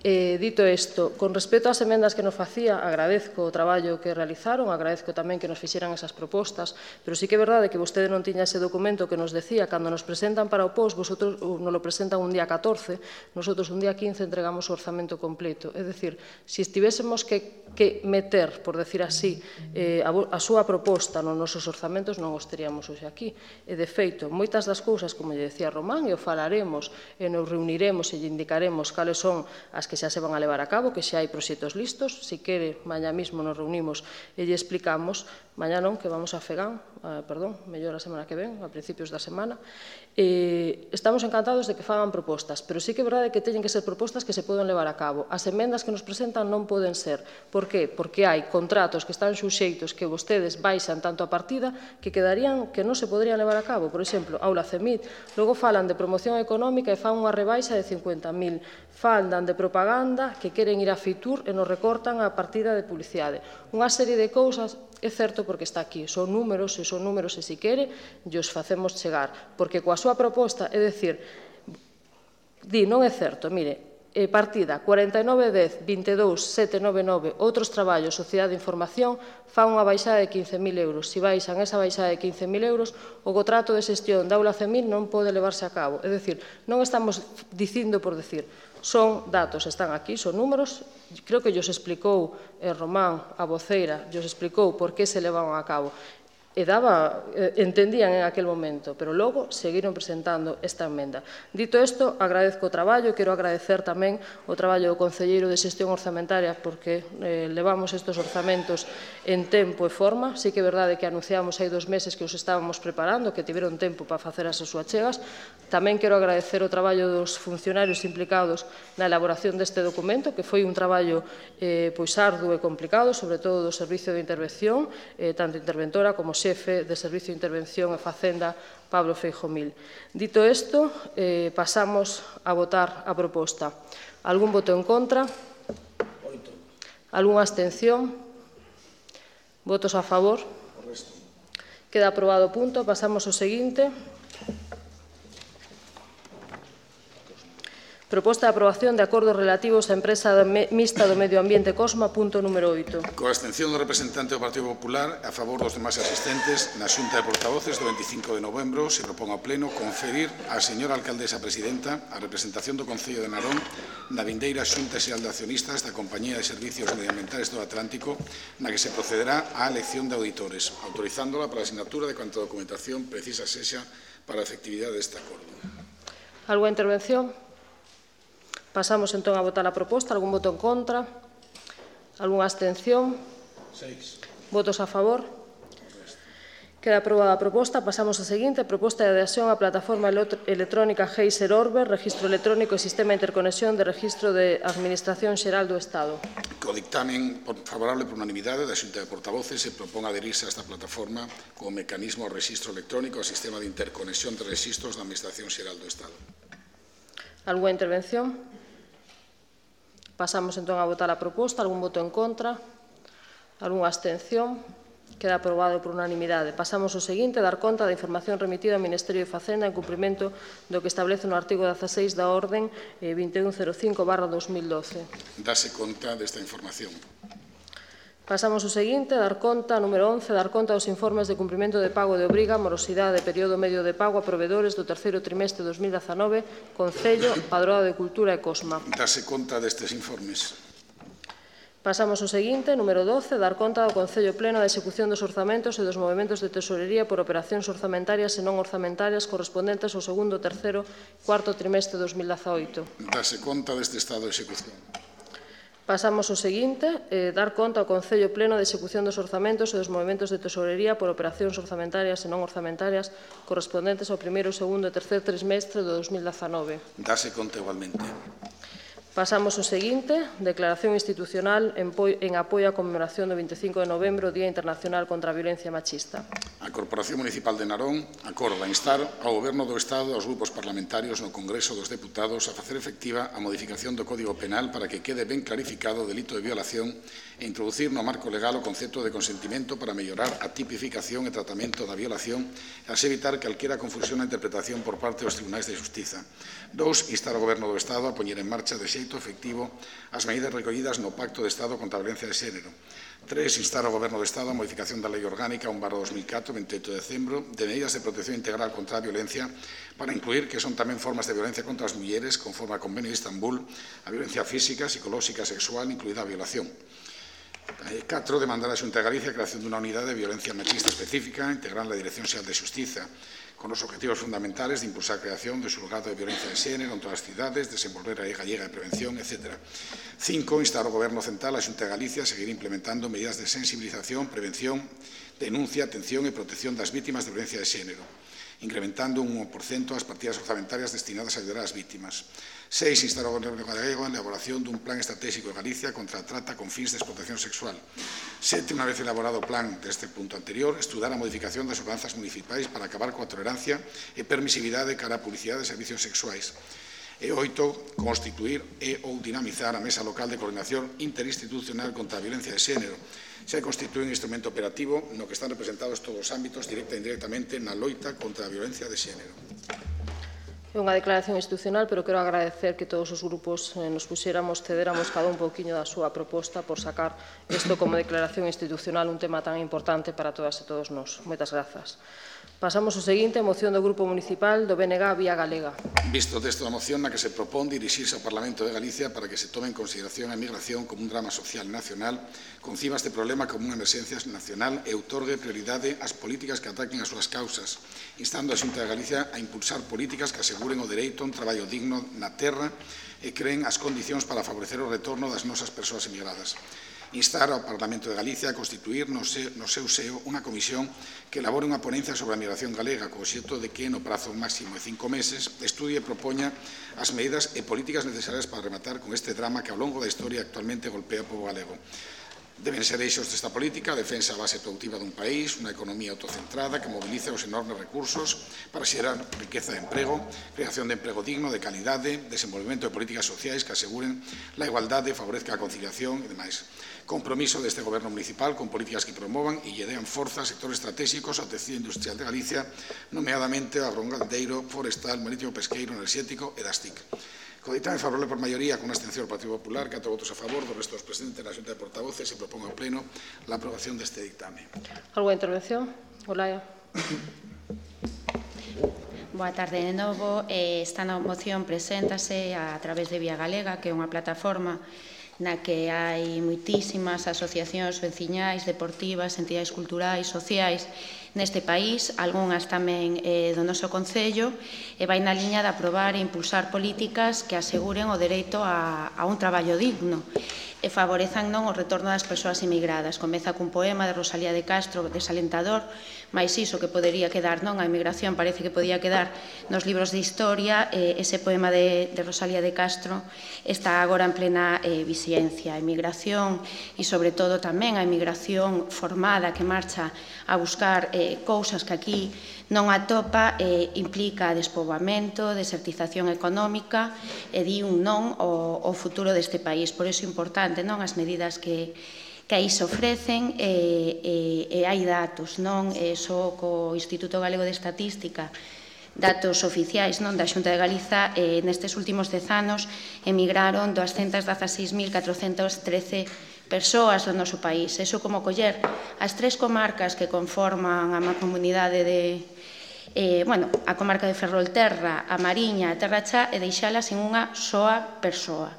Eh, dito isto, con respecto ás emendas que nos facía, agradezco o traballo que realizaron, agradezco tamén que nos fixeran esas propostas, pero sí que é verdade que vostede non tiña ese documento que nos decía, cando nos presentan para o P O S, vosotros nos lo presentan un día catorce, nosotros un día quince entregamos o orzamento completo. É dicir, se estivésemos que, que meter, por decir así, eh, a, a súa proposta nos nosos orzamentos, non os teríamos hoxe aquí. E, de feito, moitas das cousas, como lle decía Román, e o falaremos e nos reuniremos e lle indicaremos cales son as que xa se van a levar a cabo, que xa hai proxectos listos. Se quere, mañá mismo nos reunimos e lle explicamos, mañá non, que vamos a Fegán, eh, perdón, mellor a semana que ven, a principios da semana. Eh, estamos encantados de que fagan propostas, pero sí que é verdade que teñen que ser propostas que se poden levar a cabo. As emendas que nos presentan non poden ser. Por que? Porque hai contratos que están suxeitos que vostedes baixan tanto a partida que quedarían que non se poderían levar a cabo. Por exemplo, Aula CEMIT, logo falan de promoción económica e fan unha rebaixa de cincuenta mil. Falan de propaganda que queren ir a Fitur e nos recortan a partida de publicidade. Unha serie de cousas, é certo porque está aquí, son números, e son números e se quere, e os facemos chegar. Porque coa súa proposta, é dicir, di, non é certo, mire, eh, partida cuarenta e nove dez vinte e dous sete nove nove, outros traballos, Sociedade de Información, fan unha baixada de quince mil euros. Se baixan esa baixada de quince mil euros, o contrato de xestión da Aula CEMIT non pode levarse a cabo. É dicir, non estamos dicindo por decir, son datos, están aquí, son números. Creo que llos explicou eh, Román, a voceira, llos explicou por que se levaban a cabo. E daba, eh, entendían en aquel momento, pero logo seguiron presentando esta emenda. Dito isto, agradezco o traballo, quero agradecer tamén o traballo do Concelleiro de Xestión Orzamentaria, porque eh, levamos estes orzamentos en tempo e forma. Sí que é verdade que anunciamos hai dos meses que os estábamos preparando, que tiveron tempo para facer as súas chegas. Tamén quero agradecer o traballo dos funcionarios implicados na elaboración deste documento, que foi un traballo eh, pois arduo e complicado, sobre todo do Servicio de Intervención, eh, tanto interventora como xefe de Servicio de Intervención e Facenda, Pablo Feijomil. Dito isto, eh, pasamos a votar a proposta. Algún voto en contra? Algúnha abstención? Votos a favor? Queda aprobado o punto. Pasamos ao seguinte. Proposta de aprobación de acordos relativos á empresa mixta do medio ambiente Cosma, punto número oito. Coa abstención do representante do Partido Popular, a favor dos demais asistentes, na Xunta de Portavoces do veinticinco de novembro se propón ao Pleno conferir á señora alcaldesa presidenta a representación do Concello de Narón na vindeira Xunta Xeral de Accionistas da Compañía de Servicios Medioambientales do Atlántico, na que se procederá á elección de auditores, autorizándola para a asignatura de cuanta documentación precisa sexa para a efectividade deste acordo. Algúa intervención? Pasamos entón a votar a proposta. Algún voto en contra? Algúnha abstención? Seis. Votos a favor? Queda aprobada a proposta. Pasamos a seguinte. Proposta de adhesión á plataforma electrónica Geyser Orbe, registro electrónico e sistema de interconexión de registro de Administración Xeral do Estado. Co dictamen favorable por unanimidade da Xunta de Portavoces se propón adherirse a esta plataforma como mecanismo de registro electrónico ao sistema de interconexión de registros da Administración Xeral do Estado. Algúnha intervención? Pasamos entón a votar a proposta. Algún voto en contra? Algúnha abstención? Queda aprobado por unanimidade. Pasamos ao seguinte, dar conta da información remitida ao Ministerio de Facenda en cumprimento do que establece no artigo dezaseis da Orden vinte e un cero cinco barra dos mil doce. Dase conta desta información. Pasamos ao seguinte, dar conta, número once, dar conta dos informes de cumprimento de pago de obriga, morosidade, período medio de pago a provedores do terceiro trimestre de dos mil dezanove, Concello, Padroado de Cultura e Cosma. Dase conta destes informes. Pasamos ao seguinte, número doce, dar conta ao Concello Pleno da execución dos orzamentos e dos movementos de tesorería por operacións orzamentarias e non orzamentarias correspondentes ao segundo, terceiro e cuarto trimestre de dos mil dezaoito. Dase conta deste estado de execución. Pasamos ao seguinte, eh, dar conta ao Concello Pleno de execución dos orzamentos e dos movementos de tesorería por operacións orzamentarias e non orzamentarias correspondentes ao primeiro, segundo e terceiro trimestre de dos mil dezanove. Dase conta igualmente. Pasamos ao seguinte, declaración institucional en, en apoio á conmemoración do vinte e cinco de novembro, Día Internacional contra a Violencia Machista. A Corporación Municipal de Narón acorda instar ao Goberno do Estado e aos grupos parlamentarios no Congreso dos Deputados a facer efectiva a modificación do Código Penal para que quede ben clarificado o delito de violación e introducir no marco legal o concepto de consentimento para mellorar a tipificación e tratamento da violación e así evitar calquera confusión na interpretación por parte dos tribunais de xustiza. Dous, instar ao Goberno do Estado a poñer en marcha de xeito efectivo as medidas recollidas no Pacto de Estado contra a Violencia de Xénero. Tres, instar ao Goberno do Estado a modificación da Lei Orgánica un barra dos mil catro, veinte e oito de decembro, de medidas de protección integral contra a violencia para incluir que son tamén formas de violencia contra as mulleres conforme ao Convenio de Estambul, a violencia física, psicolóxica e sexual, incluída a violación. catro. Demandar a Xunta de Galicia a creación dunha unidade de violencia machista específica integrada na Dirección Xeral de Xustiza, con os objetivos fundamentales de impulsar a creación do xulgado de violencia de xénero en todas as cidades, desenvolver a lei gallega de prevención, etcétera. cinco. Instar ao Goberno Central a Xunta de Galicia a seguir implementando medidas de sensibilización, prevención, denuncia, atención e protección das vítimas de violencia de xénero, incrementando un un por cento as partidas orzamentarias destinadas a ayudar ás vítimas. seis. Instar ao Goberno galego a elaboración dun plan estratégico de Galicia contra a trata con fins de explotación sexual. sete. Unha vez elaborado o plan deste punto anterior, estudar a modificación das ordenanzas municipais para acabar coa tolerancia e permisividade cara á publicidade de servicios sexuais. E oito. Constituir e ou dinamizar a Mesa Local de Coordinación Interinstitucional contra a Violencia de Xénero. Se constitúe un instrumento operativo no que están representados todos os ámbitos directa e indirectamente na loita contra a violencia de xénero. É unha declaración institucional, pero quero agradecer que todos os grupos eh, nos puxéramos, cedéramos cada un pouquiño da súa proposta por sacar isto como declaración institucional, un tema tan importante para todas e todos nós. Moitas grazas. Pasamos ao seguinte, moción do Grupo Municipal do B N G Vía Galega. Visto o texto da moción na que se propón dirixirse ao Parlamento de Galicia para que se tome en consideración a migración como un drama social nacional, conciba este problema como unha emerxencia nacional e outorgue prioridade ás políticas que ataquen as súas causas, instando a Xunta de Galicia a impulsar políticas que aseguren o dereito a un traballo digno na terra e creen as condicións para favorecer o retorno das nosas persoas emigradas. Instar ao Parlamento de Galicia a constituir no seu seo unha comisión que elabore unha ponencia sobre a migración galega co obxecto de que, no prazo máximo de cinco meses, estudie e propoña as medidas e políticas necesarias para rematar con este drama que ao longo da historia actualmente golpea o pobo galego. Deben ser eixos desta política a defensa da base productiva dun país, unha economía autocentrada que movilice os enormes recursos para xerar riqueza de emprego, creación de emprego digno, de calidade, desenvolvemento de políticas sociais que aseguren a igualdade, favorezca a conciliación e demais. Compromiso deste Goberno municipal con políticas que promovan e lle dean forza a sectores estratégicos ao tecido industrial de Galicia, nomeadamente ao rongaldeiro, forestal, marítimo, pesqueiro, enerxético e das T I C. Co ditame favorable por maioría, con unha abstención do Partido Popular, catro votos a favor, do resto dos presentes na Xunta de Portavoces, se propón ao Pleno a aprobación deste dictame. Alguna intervención? Olaya. Boa tarde de novo. Esta moción preséntase a través de Vía Galega, que é unha plataforma na que hai moitísimas asociacións veciñais, deportivas, entidades culturais, sociais neste país, algunhas tamén eh, do noso Concello, e vai na liña de aprobar e impulsar políticas que aseguren o dereito a, a un traballo digno e favorezan non o retorno das persoas emigradas. Comeza cun poema de Rosalía de Castro desalentador, mais iso que podería quedar, non? A emigración parece que podía quedar nos libros de historia, eh, ese poema de, de Rosalía de Castro está agora en plena eh, vixencia. A emigración e, sobre todo, tamén a emigración formada que marcha a buscar eh, cousas que aquí non atopa, eh, implica despoboamento, desertización económica e di un non ao, ao futuro deste país. Por iso é importante, non, as medidas que que aí se ofrecen e, e, e hai datos, non? E só co Instituto Galego de Estatística, datos oficiais non da Xunta de Galiza, eh, nestes últimos dez anos emigraron doscientas dezaseis mil catrocentas trece persoas do noso país. Eso como coller as tres comarcas que conforman a mancomunidade de eh, bueno, a comarca de Ferrolterra, a Mariña, a Terra Chá, e deixalas en unha soa persoa.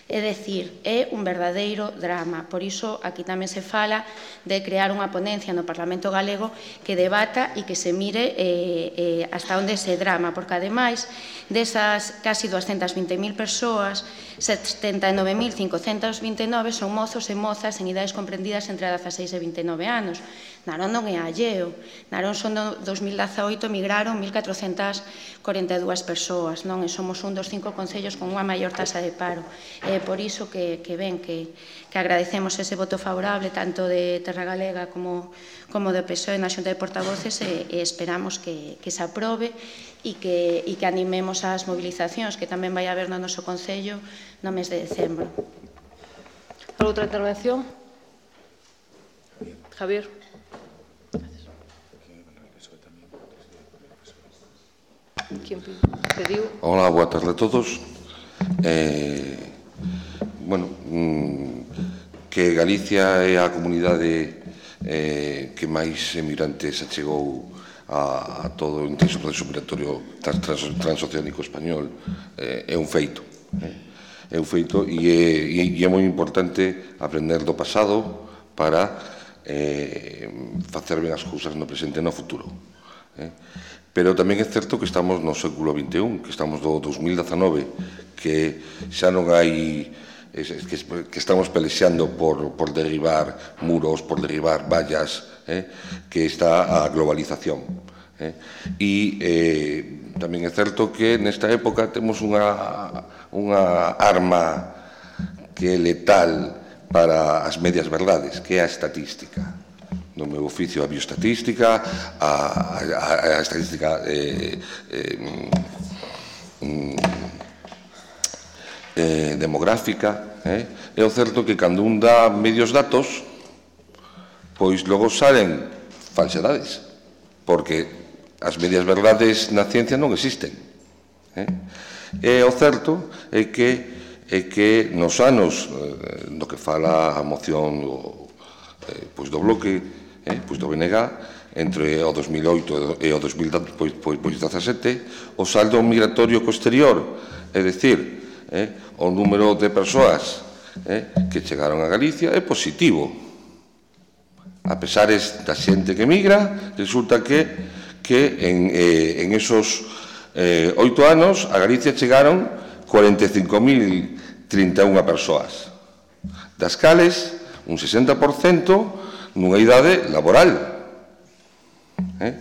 É dicir, é un verdadeiro drama. Por iso, aquí tamén se fala de crear unha ponencia no Parlamento Galego que debata e que se mire eh, eh, hasta onde ese drama, porque, ademais, desas casi doscientas vinte mil persoas, setenta e nove mil cincocentos vinte e nove son mozos e mozas en idades comprendidas entre dezaseis e vinte e nove anos. Narón non é alleo. Narón son no dos mil dezaoito migraron mil catrocentas corenta e dúas persoas, non? E somos un dos cinco concellos con unha maior taxa de paro. É por iso que, que ven que, que agradecemos ese voto favorable tanto de Terra Galega como, como do P S O E na Xunta de Portavoces e, e esperamos que, que se aprobe e que, e que animemos as movilizacións que tamén vai haber no noso concello no mes de decembro. Outra intervención? Javier. Hola, boa tarde a todos. Eh, bueno, mm, que Galicia é a comunidade eh, que máis emigrantes achegou a, a todo o intenso proceso migratorio trans, trans, transoceánico español eh, é un feito. Eh? É un feito e é, e é moi importante aprender do pasado para eh, facer ben as cousas no presente e no futuro. Eh? Pero tamén é certo que estamos no século vinte e un, que estamos do dos mil dezanove, que xa non hai, que estamos pelexando por, por derribar muros, por derribar vallas, eh, que está a globalización. Eh. E eh, tamén é certo que nesta época temos unha, unha arma que é letal para as medias verdades, que é a estatística. No meu oficio a bioestatística, a, a, a estadística eh, eh, mm, eh, demográfica. Eh? É o certo que cando un dá medios datos, pois logo salen falsedades, porque as medias verdades na ciencia non existen. Eh? E o certo é que, é que nos anos eh, do que fala a moción do, eh, pois do bloque, Eh, pois do B N G, entre o dos mil oito e o dos mil dezasete, o saldo migratorio co exterior, é dicir, eh, o número de persoas eh, que chegaron a Galicia é positivo. A pesar da xente que migra, resulta que, que en, eh, en esos eh, oito anos a Galicia chegaron cuarenta e cinco mil trinta e unha persoas, das cales un sesenta por cento nunha idade laboral. Eh?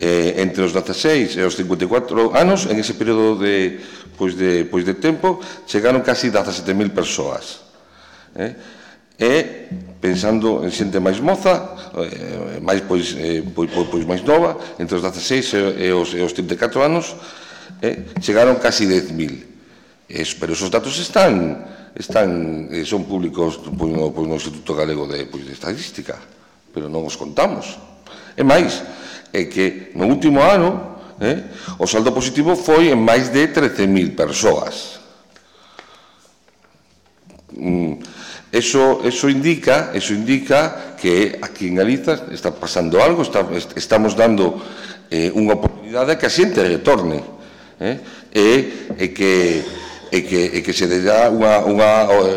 Eh, entre os dezaseis e os cincuenta e catro anos, en ese período de, pois de, pois de tempo, chegaron casi dezasete mil persoas. Eh? E, pensando en xente máis moza, eh, máis, pois, eh, pois, pois máis nova, entre os dezaseis e os, e os trinta e catro anos, eh, chegaron casi dez mil. Es, pero esos datos están, están eh, son públicos pois, no, pois, no Instituto Galego de, pois, de Estadística, pero non os contamos. E máis, é que no último ano eh, o saldo positivo foi en máis de trece mil persoas. Mm, eso, eso, indica, eso indica que aquí en Galiza está pasando algo, está, estamos dando eh, unha oportunidade a que a xente retorne. Eh, e, e que e que, e que se dá unha, unha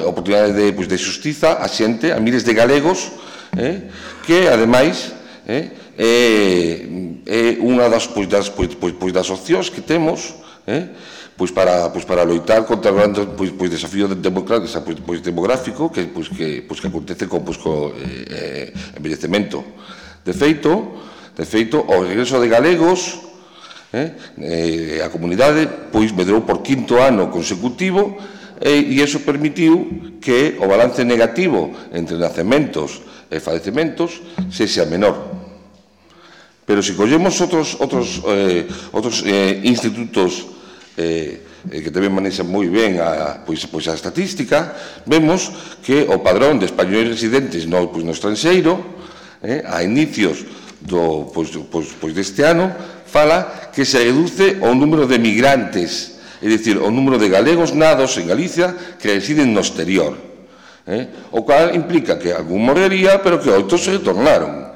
oportunidade de, pois, de xustiza a xente, a miles de galegos, eh, que, ademais, eh, é, é unha das, pois, das, pois, pois, pois, das opcións que temos eh, pois, para, pois, para loitar contra o grande pois, pois, desafío demográfico, pois, pois, demográfico que, pois, que, pois, que acontece con pois, co, eh, envellecemento. De feito, de feito, o regreso de galegos, eh, eh, a comunidade pois, medrou por quinto ano consecutivo eh, e iso permitiu que o balance negativo entre nacementos e falecementos sexa menor. Pero se collemos outros, outros, eh, outros eh, institutos eh, que tamén manexan moi ben a, pois, pois a estatística, vemos que o padrón de españoles residentes no, pois, no estranxeiro, eh, a inicios do, pois, pois, pois deste ano, fala que se reduce o número de migrantes, é dicir, o número de galegos nados en Galicia que residen no exterior. Eh? O cual implica que algún morrería, pero que outros se retornaron.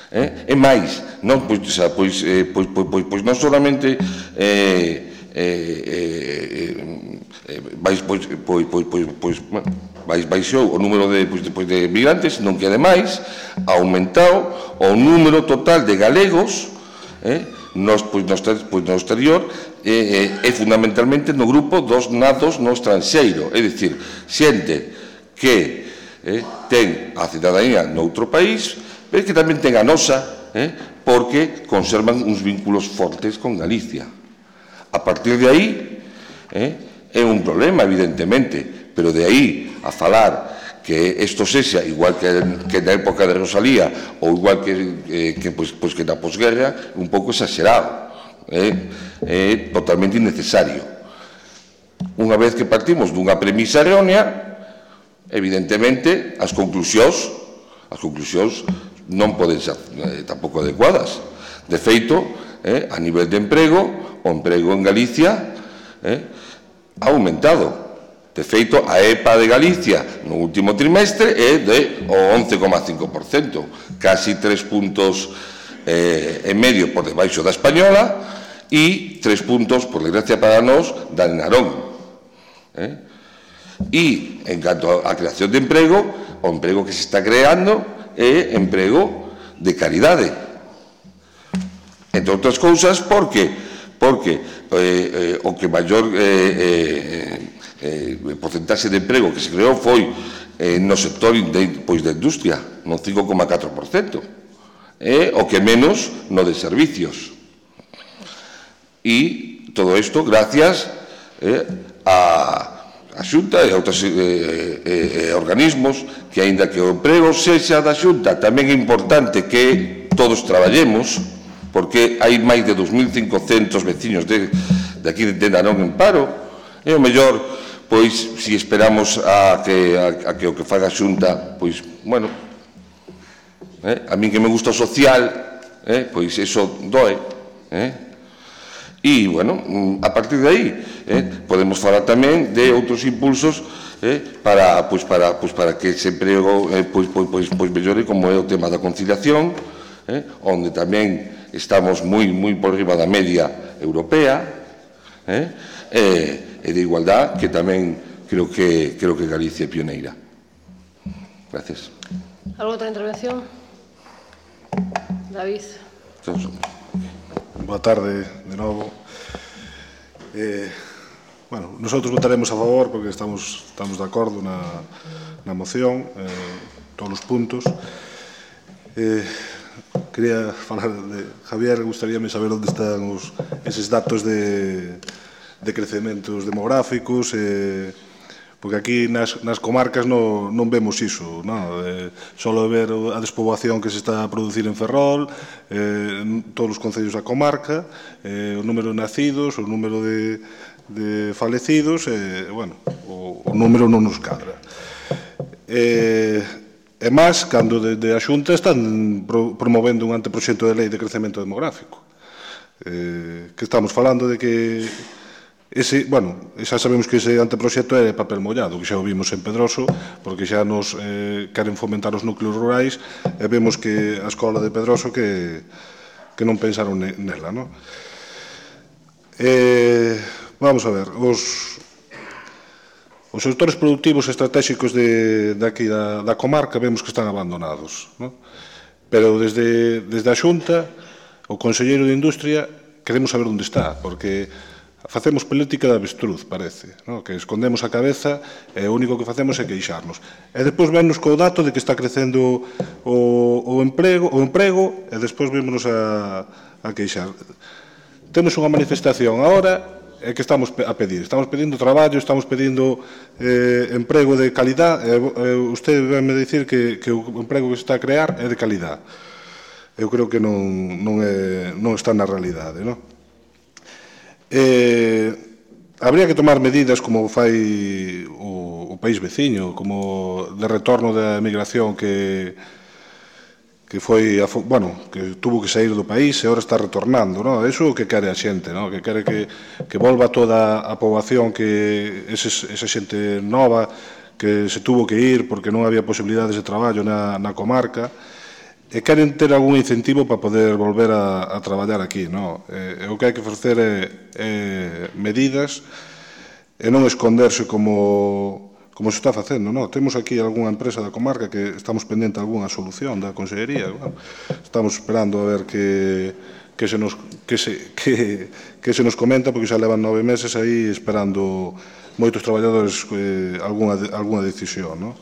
Eh? E máis, non, pois, pois, eh, pois, pois, pois, pois non solamente eh, eh, eh, vais, pois, pois, pois, pois, pois, bueno, baixou o número de, pois, de, de migrantes, non que ademais aumentado o número total de galegos eh, nos, pois, no, pois, no exterior e eh, eh, fundamentalmente no grupo dos natos no estranxeiro, é dicir, xente que eh, ten a cidadanía noutro país, pero que tamén ten a nosa, eh, porque conservan uns vínculos fortes con Galicia. A partir de aí, eh, é un problema, evidentemente, pero de aí a falar que isto sexa igual que, que na época de Rosalía ou igual que, eh, que, pues, pues que na posguerra, un pouco exagerado, é eh, eh, totalmente innecesario. Unha vez que partimos dunha premisa errónea, evidentemente as conclusións as conclusións non poden ser eh, tampouco adecuadas. De feito, eh, a nivel de emprego, o emprego en Galicia eh, ha aumentado. De feito, a E P A de Galicia no último trimestre é de o once coma cinco por cento, casi tres puntos eh, e medio por debaixo da española e tres puntos, por desgracia para nós, da de Narón. Eh? E, en canto á creación de emprego, o emprego que se está creando é emprego de calidade. Entre outras cousas, por que? Porque eh, eh, o que maior eh, eh, eh, porcentaxe de emprego que se creou foi eh, no sector de, pois, da industria, no cinco coma catro por cento, e o que menos no de servicios. E todo isto gracias eh, a a Xunta e a outros eh, eh, eh, organismos que, aínda que o emprego sexa da Xunta, tamén é importante que todos traballemos, porque hai máis de dos mil cincocentos veciños de, de aquí de Narón en paro, e o mellor, pois, se esperamos a que, a, a que o que faga a Xunta, pois, bueno, eh, a min que me gusta o social, eh, pois eso doe, eh, e, bueno, a partir de aí eh, podemos falar tamén de outros impulsos eh, para, pois, para, pois, para que ese emprego eh, pois, pois, pois, pois mellore, como é o tema da conciliación, eh, onde tamén estamos moi, moi por riba da media europea, eh, e, e de igualdad, que tamén creo que, creo que Galicia é pioneira. Gracias. ¿Alguna outra intervención? David. Todos. Boa tarde, de novo. Eh, bueno, nosotros votaremos a favor porque estamos, estamos de acordo na, na moción, eh, todos os puntos. Eh, quería falar de Javier, gustaríame saber onde están os, eses datos de, de crecementos demográficos, eh, porque aquí nas, nas comarcas no, non vemos iso, no? Eh, solo ver a despoboación que se está a producir en Ferrol, eh, todos os concellos da comarca, eh, o número de nacidos, o número de, de falecidos, eh, bueno, o, o número non nos cadra. Eh, e máis, cando desde a Xunta están pro, promovendo un anteproxecto de lei de crecemento demográfico. Eh, que estamos falando de que ese, bueno, xa sabemos que ese anteproxecto é papel mollado, que xa o vimos en Pedroso, porque xa nos eh, queren fomentar os núcleos rurais, e vemos que a escola de Pedroso que, que non pensaron nela, non? Eh, vamos a ver, os, os sectores productivos estratégicos de, de aquí da, da comarca vemos que están abandonados, non? Pero desde, desde a Xunta, o Conselleiro de Industria, queremos saber onde está, porque facemos política de avestruz, parece, no? Que escondemos a cabeza e o único que facemos é queixarnos. E despois vennos co dato de que está crecendo o, o, emprego, o emprego e despois vémonos a, a queixar. Temos unha manifestación agora é que estamos a pedir. Estamos pedindo traballo, estamos pedindo eh, emprego de calidad e eh, usted venme dicir que, que o emprego que se está a crear é de calidad. Eu creo que non, non, é, non está na realidade, non? Eh, habría que tomar medidas como fai o, o país veciño, como de retorno da emigración que que foi, bueno, que tuvo que sair do país e agora está retornando, non? Eso é o que quere a xente, non? Que quere que, que volva toda a poboación, que eses, esa xente nova que se tuvo que ir porque non había posibilidades de traballo na, na comarca, e queren ter algún incentivo para poder volver a, a traballar aquí, non? E, e o que hai que ofrecer é, é medidas e non esconderse como, como se está facendo, non? Temos aquí algunha empresa da comarca que estamos pendente de algunha solución da Consellería, bueno, estamos esperando a ver que, que, se nos, que, se, que, que se nos comenta, porque xa levan nove meses aí esperando moitos traballadores eh, algunha, algunha decisión, non?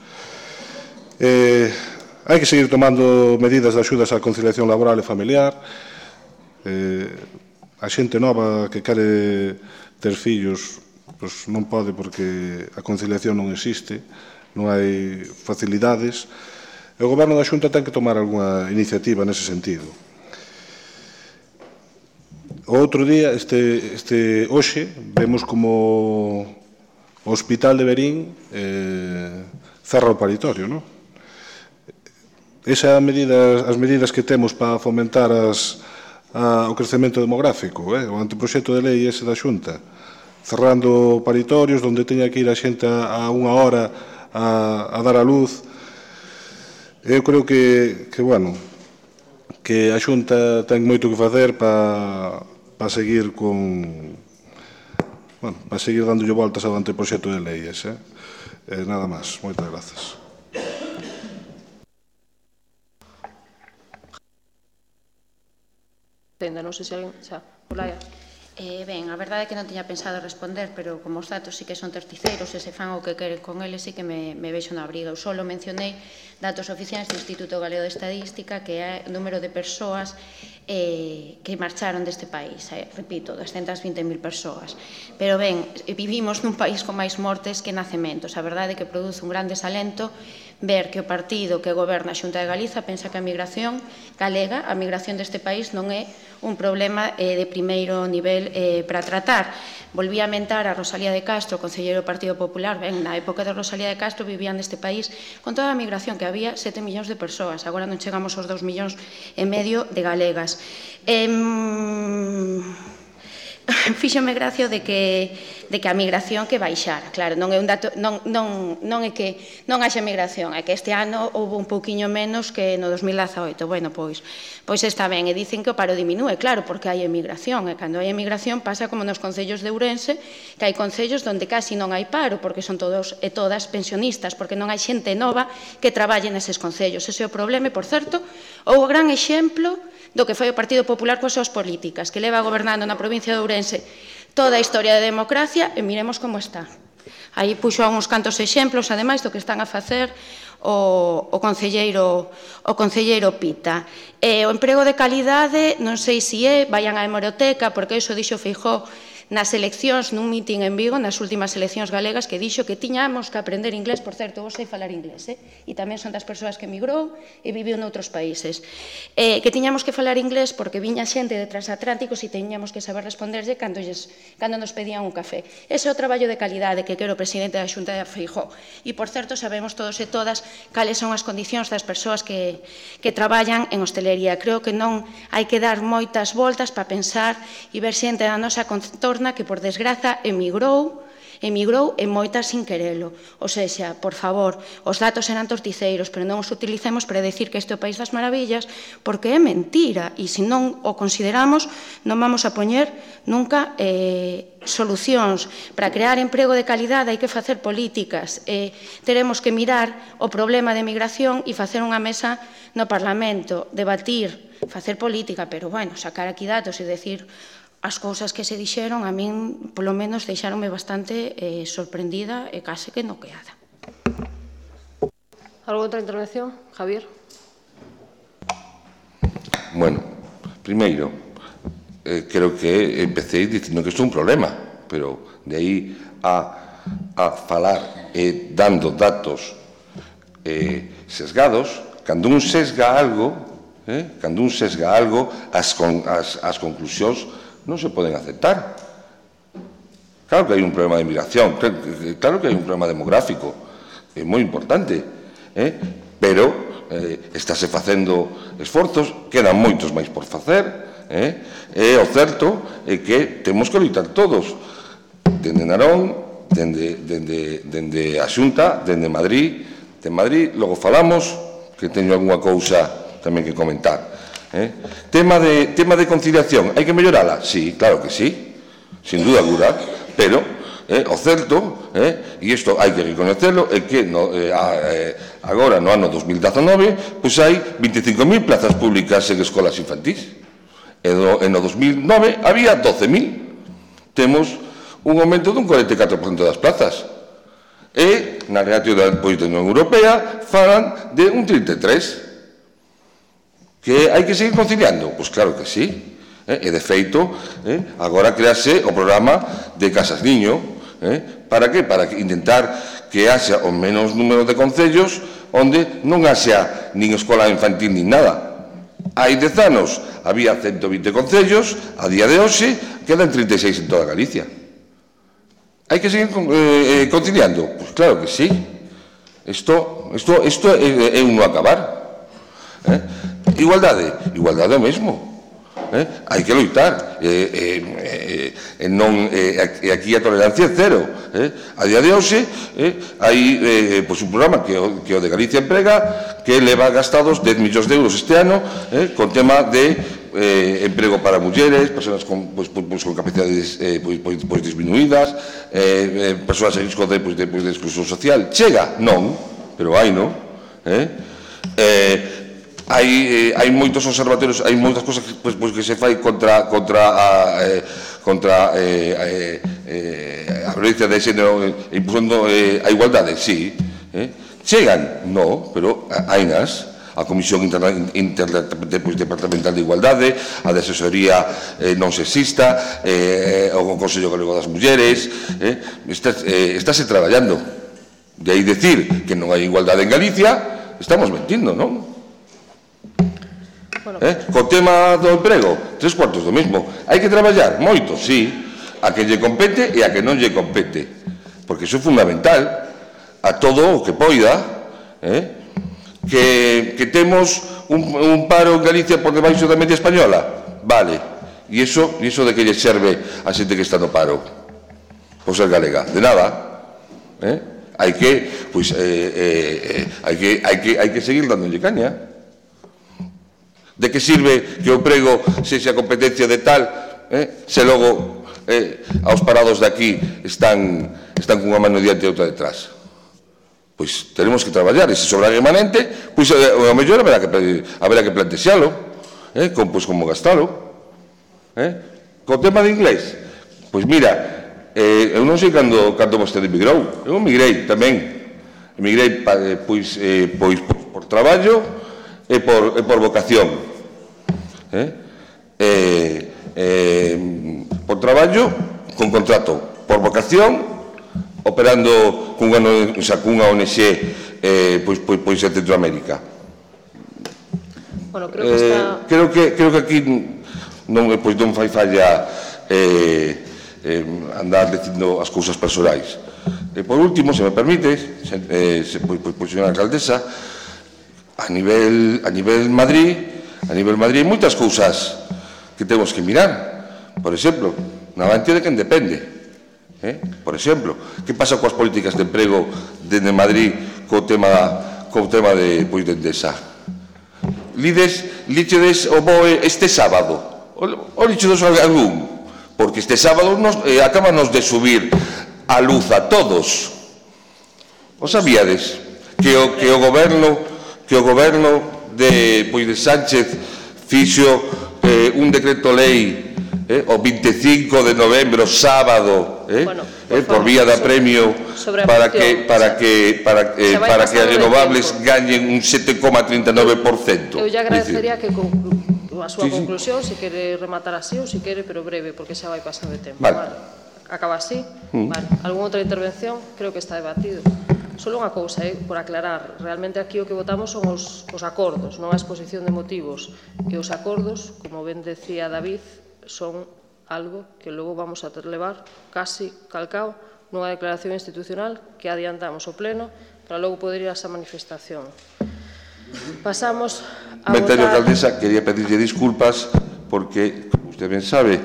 Eh, Hai que seguir tomando medidas de axudas á conciliación laboral e familiar. Eh, a xente nova que quere ter fillos pois non pode porque a conciliación non existe, non hai facilidades. E o Goberno da Xunta ten que tomar algunha iniciativa nese sentido. O outro día, este, este hoxe, vemos como o Hospital de Verín eh, cerra o paritorio, non? Esas medidas, as medidas que temos para fomentar as, a, o crecemento demográfico, eh? O anteproxecto de lei ese da Xunta, cerrando paritorios onde teña que ir a xente a, a unha hora a, a dar a luz. Eu creo que, que, bueno, que a Xunta ten moito que facer para, para seguir con, bueno, para seguir dándolle voltas ao anteproxecto de lei ese. Eh? Eh, nada máis. Moitas grazas. Tenda, non sei se alguén xa, Olaya. Eh, ben, a verdade é que non tiña pensado responder, pero como os datos sí que son terceiros e se fan o que queren con eles, sí que me, me vexo na briga. Eu só mencionei datos oficiais do Instituto Galego de Estadística, que é o número de persoas eh, que marcharon deste país. Eh, repito, doscientas vinte mil persoas. Pero ben, vivimos nun país con máis mortes que nacementos. A verdade é que produce un gran desalento ver que o partido que goberna a Xunta de Galiza pensa que a migración galega, a migración deste país non é un problema eh, de primeiro nivel eh, para tratar. Volví a mentar a Rosalía de Castro, concelleiro do Partido Popular. Ben, na época de Rosalía de Castro vivían neste país con toda a migración que había sete millóns de persoas. Agora non chegamos aos dous millóns e medio de galegas. Eh, Fíxome gracia de que, de que a migración que baixara. Claro, non é un dato, non, non, non é que non haxa migración, é que este ano houve un pouquiño menos que no dos mil dezaoito. Bueno, pois, pois está ben, e dicen que o paro diminúe, claro, porque hai emigración, e cando hai emigración pasa como nos concellos de Ourense, que hai concellos onde casi non hai paro, porque son todos e todas pensionistas, porque non hai xente nova que traballe neses concellos. Ese é o problema, e, por certo, o gran exemplo do que foi o Partido Popular coas súas políticas, que leva gobernando na provincia de Ourense toda a historia de democracia, e miremos como está. Aí puxo uns cantos exemplos, ademais, do que están a facer o, o, concelleiro, o concelleiro Pita. E o emprego de calidade, non sei se é, vayan á hemeroteca, porque iso dixo Feijóo nas eleccións, nun mitin en Vigo, nas últimas eleccións galegas, que dixo que tiñamos que aprender inglés. Por certo, eu sei falar inglés, eh? E tamén son das persoas que emigrou e viviu noutros países. Eh, que tiñamos que falar inglés porque viña xente de transatlánticos e tiñamos que saber responderlle cando, lles, cando nos pedían un café. Ese é o traballo de calidade que quero o presidente da Xunta de Feijóo. E, por certo, sabemos todos e todas cales son as condicións das persoas que, que traballan en hostelería. Creo que non hai que dar moitas voltas para pensar e ver xente da nosa contorna que, por desgraza, emigrou, emigrou e moitas sin querelo. O sexa, por favor, os datos eran torticeiros, pero non os utilicemos para decir que este é o país das maravillas, porque é mentira, e se non o consideramos, non vamos a poñer nunca eh, solucións. Para crear emprego de calidade hai que facer políticas. Eh, teremos que mirar o problema de emigración e facer unha mesa no Parlamento, debatir, facer política, pero, bueno, sacar aquí datos e decir as cousas que se dixeron, a min, polo menos, deixaronme bastante eh, sorprendida e case que noqueada. Algo outra intervención? Javier? Bueno, primeiro, eh, creo que empecé dicindo que isto é un problema, pero de aí a, a falar eh, dando datos eh, sesgados, cando un sesga algo, eh, cando un sesga algo, as, con, as, as conclusións non se poden aceptar. Claro que hai un problema de migración, claro que hai un problema demográfico, é moi importante, eh? pero eh, estáse facendo esforzos, quedan moitos máis por facer, eh? e o certo é que temos que loitar todos, dende Narón, dende, dende, dende a Xunta, dende Madrid, de Madrid, logo falamos, que teño algunha cousa tamén que comentar. Eh? Tema, de, tema de conciliación, hai que mellorala? Sí, claro que sí, sin duda alguna, pero eh, o certo, eh, e isto hai que reconocerlo, é que no, eh, eh, agora no ano dos mil dezanove pois hai vinte e cinco mil plazas públicas en escolas infantís, e no, e no dos mil nove había doce mil. Temos un aumento dun cuarenta e catro por cento das plazas, e na relativa da Unión Europea falan de un trinta e tres por cento. Que hai que seguir conciliando? Pois claro que sí. Eh? E de feito, eh, agora crease o programa de Casas Niño. Eh? Para que? Para intentar que haxa o menos número de concellos onde non haxa nin escola infantil nin nada. Hai dez anos había ciento vinte concellos, a día de hoxe quedan trinta e seis en toda Galicia. Hai que seguir eh, conciliando? Pois claro que sí. Isto, isto, isto é, é un no acabar. Eh? Igualdade, igualdade é o mesmo. Eh? Hai que loitar. E eh, eh, eh, non, eh, aquí a tolerancia é cero. Eh? A día de hoxe eh, hai eh, pues un programa que o, que o de Galicia Emprega que leva gastados dez millóns de euros este ano eh, con tema de eh, emprego para mulleres, persoas con, pues, pues, con capacidades eh, pues, pues, pues disminuídas, eh, eh, persoas en risco de, pues, de, pues, de exclusión social. Chega? Non, pero hai, non? Eh? Eh, Hai, eh, hai moitos observatorios, hai moitas cosas que, pues, pues, que se fai contra contra a, eh, contra eh, eh, a violencia de xénero, eh, impulsando eh, a igualdade, sí. Eh? Chegan? No, pero hai nas. A Comisión Interdepartamental de Igualdade, a de Asesoría eh, Non Sexista, eh, o Consello Galego das Mulleres, eh, está, eh, estáse traballando. De aí decir que non hai igualdade en Galicia, estamos mentindo, non? Bueno, eh? Co tema do emprego, tres cuartos do mesmo. Hai que traballar moito, sí, a que lle compete e a que non lle compete, porque iso é fundamental. A todo o que poida, eh? que, que temos un, un paro en Galicia por debaixo da media española, vale, e iso, e iso de que lle serve a xente que está no paro por ser galega, de nada. Eh? Hai que, pois, eh, eh, hai que, hai que, hai que seguir dándolle caña. De que sirve que o emprego sexa competencia de tal, eh, se logo eh, aos parados de aquí están, están cunha mano diante e outra detrás? Pois tenemos que traballar, e se sobra remanente, pois eh, o mellor haberá que, haberá que plantexalo, eh, con, pois como gastalo. Eh? Co tema de inglés, pois mira, eh, eu non sei cando, cando vostede emigrou, eu emigrei tamén, emigrei eh, pois, eh, pois por traballo, e por, e por vocación. Eh? Eh, eh, por traballo, con contrato. Por vocación, operando cunha, o sea, cunha O N G eh, pois, pois, pois en Centroamérica. Bueno, creo que está... Eh, creo, que, creo que aquí non, pois, non fai falla eh, eh, andar dicindo as cousas personais. E por último, se me permite, eh, se, pois, pois, pois, señora alcaldesa, A nivel, a nivel Madrid, a nivel Madrid hai moitas cousas que temos que mirar. Por exemplo, na garantía de quen depende. Eh? Por exemplo, que pasa coas políticas de emprego dende Madrid co tema, co tema de, pois, de Endesa? Lides, lichedes o B O E este sábado. O, o lichedes algún. Porque este sábado nos, eh, acabanos de subir a luz a todos. O sabíades que o, que o goberno que o goberno de, pois, de Sánchez fixo eh, un decreto lei eh, o vinte e cinco de novembro, sábado, eh, bueno, por, eh, por vía de apremio para que para que para eh, para que as renovables gañen un sete coma trinta e nove por cento. Eu lle agradecería que conclu a súa sí, conclusión, sí. Se quere rematar así ou se quere, pero breve, porque xa vai pasar de tempo. Vale. Vale. Acaba así? Mm. Vale. Algún outra intervención? Creo que está debatido. Solo unha cousa, eh, por aclarar, realmente aquí o que votamos son os, os acordos, non a exposición de motivos, e os acordos, como ben decía David, son algo que logo vamos a levar casi calcao nunha declaración institucional que adiantamos o pleno para logo poder ir a esa manifestación. Pasamos a votar... votar... Alcaldesa, quería pedirlle disculpas porque, como usted ben sabe,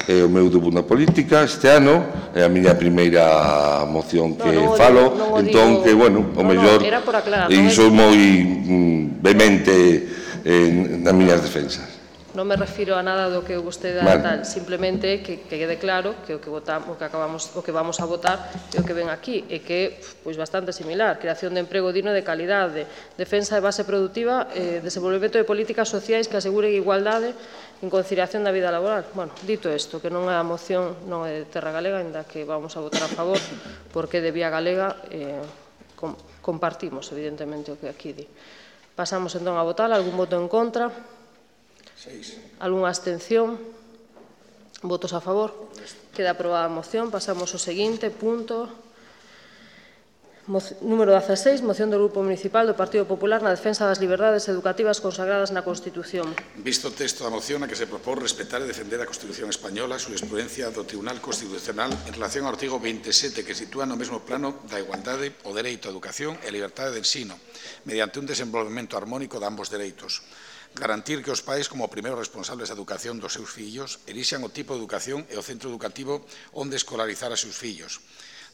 é o meu debut na política este ano, é a miña primeira moción que no, no falo, digo, no entón digo... que, bueno, o no, mellor, no, era por aclarar, e non iso é moi mm, vehemente en, nas miñas defensas. Non me refiro a nada do que vostede dá tal, simplemente que, que quede claro que o que, votamos, o, que acabamos, o que vamos a votar é o que ven aquí, e que é pois, bastante similar. Creación de emprego digno de calidade, defensa de base productiva, eh, desenvolvemento de políticas sociais que aseguren igualdade en conciliación da vida laboral. Bueno, dito isto, que non é a moción non é de Terra Galega, ainda que vamos a votar a favor, porque de Vía Galega eh, com, compartimos, evidentemente, o que aquí di. Pasamos entón a votar, algún voto en contra? Algúnha abstención? Votos a favor? Queda aprobada a moción. Pasamos ao seguinte punto. Número dieciséis, moción do Grupo Municipal do Partido Popular na defensa das liberdades educativas consagradas na Constitución. Visto o texto da moción na que se propón respetar e defender a Constitución española, a jurisprudencia do Tribunal Constitucional en relación ao artigo veintisiete que sitúa no mesmo plano da igualdade, o dereito á educación e a liberdade de ensino, mediante un desenvolvemento armónico de ambos dereitos. Garantir que os pais, como primeiros responsables da educación dos seus fillos, elixan o tipo de educación e o centro educativo onde escolarizar a seus fillos.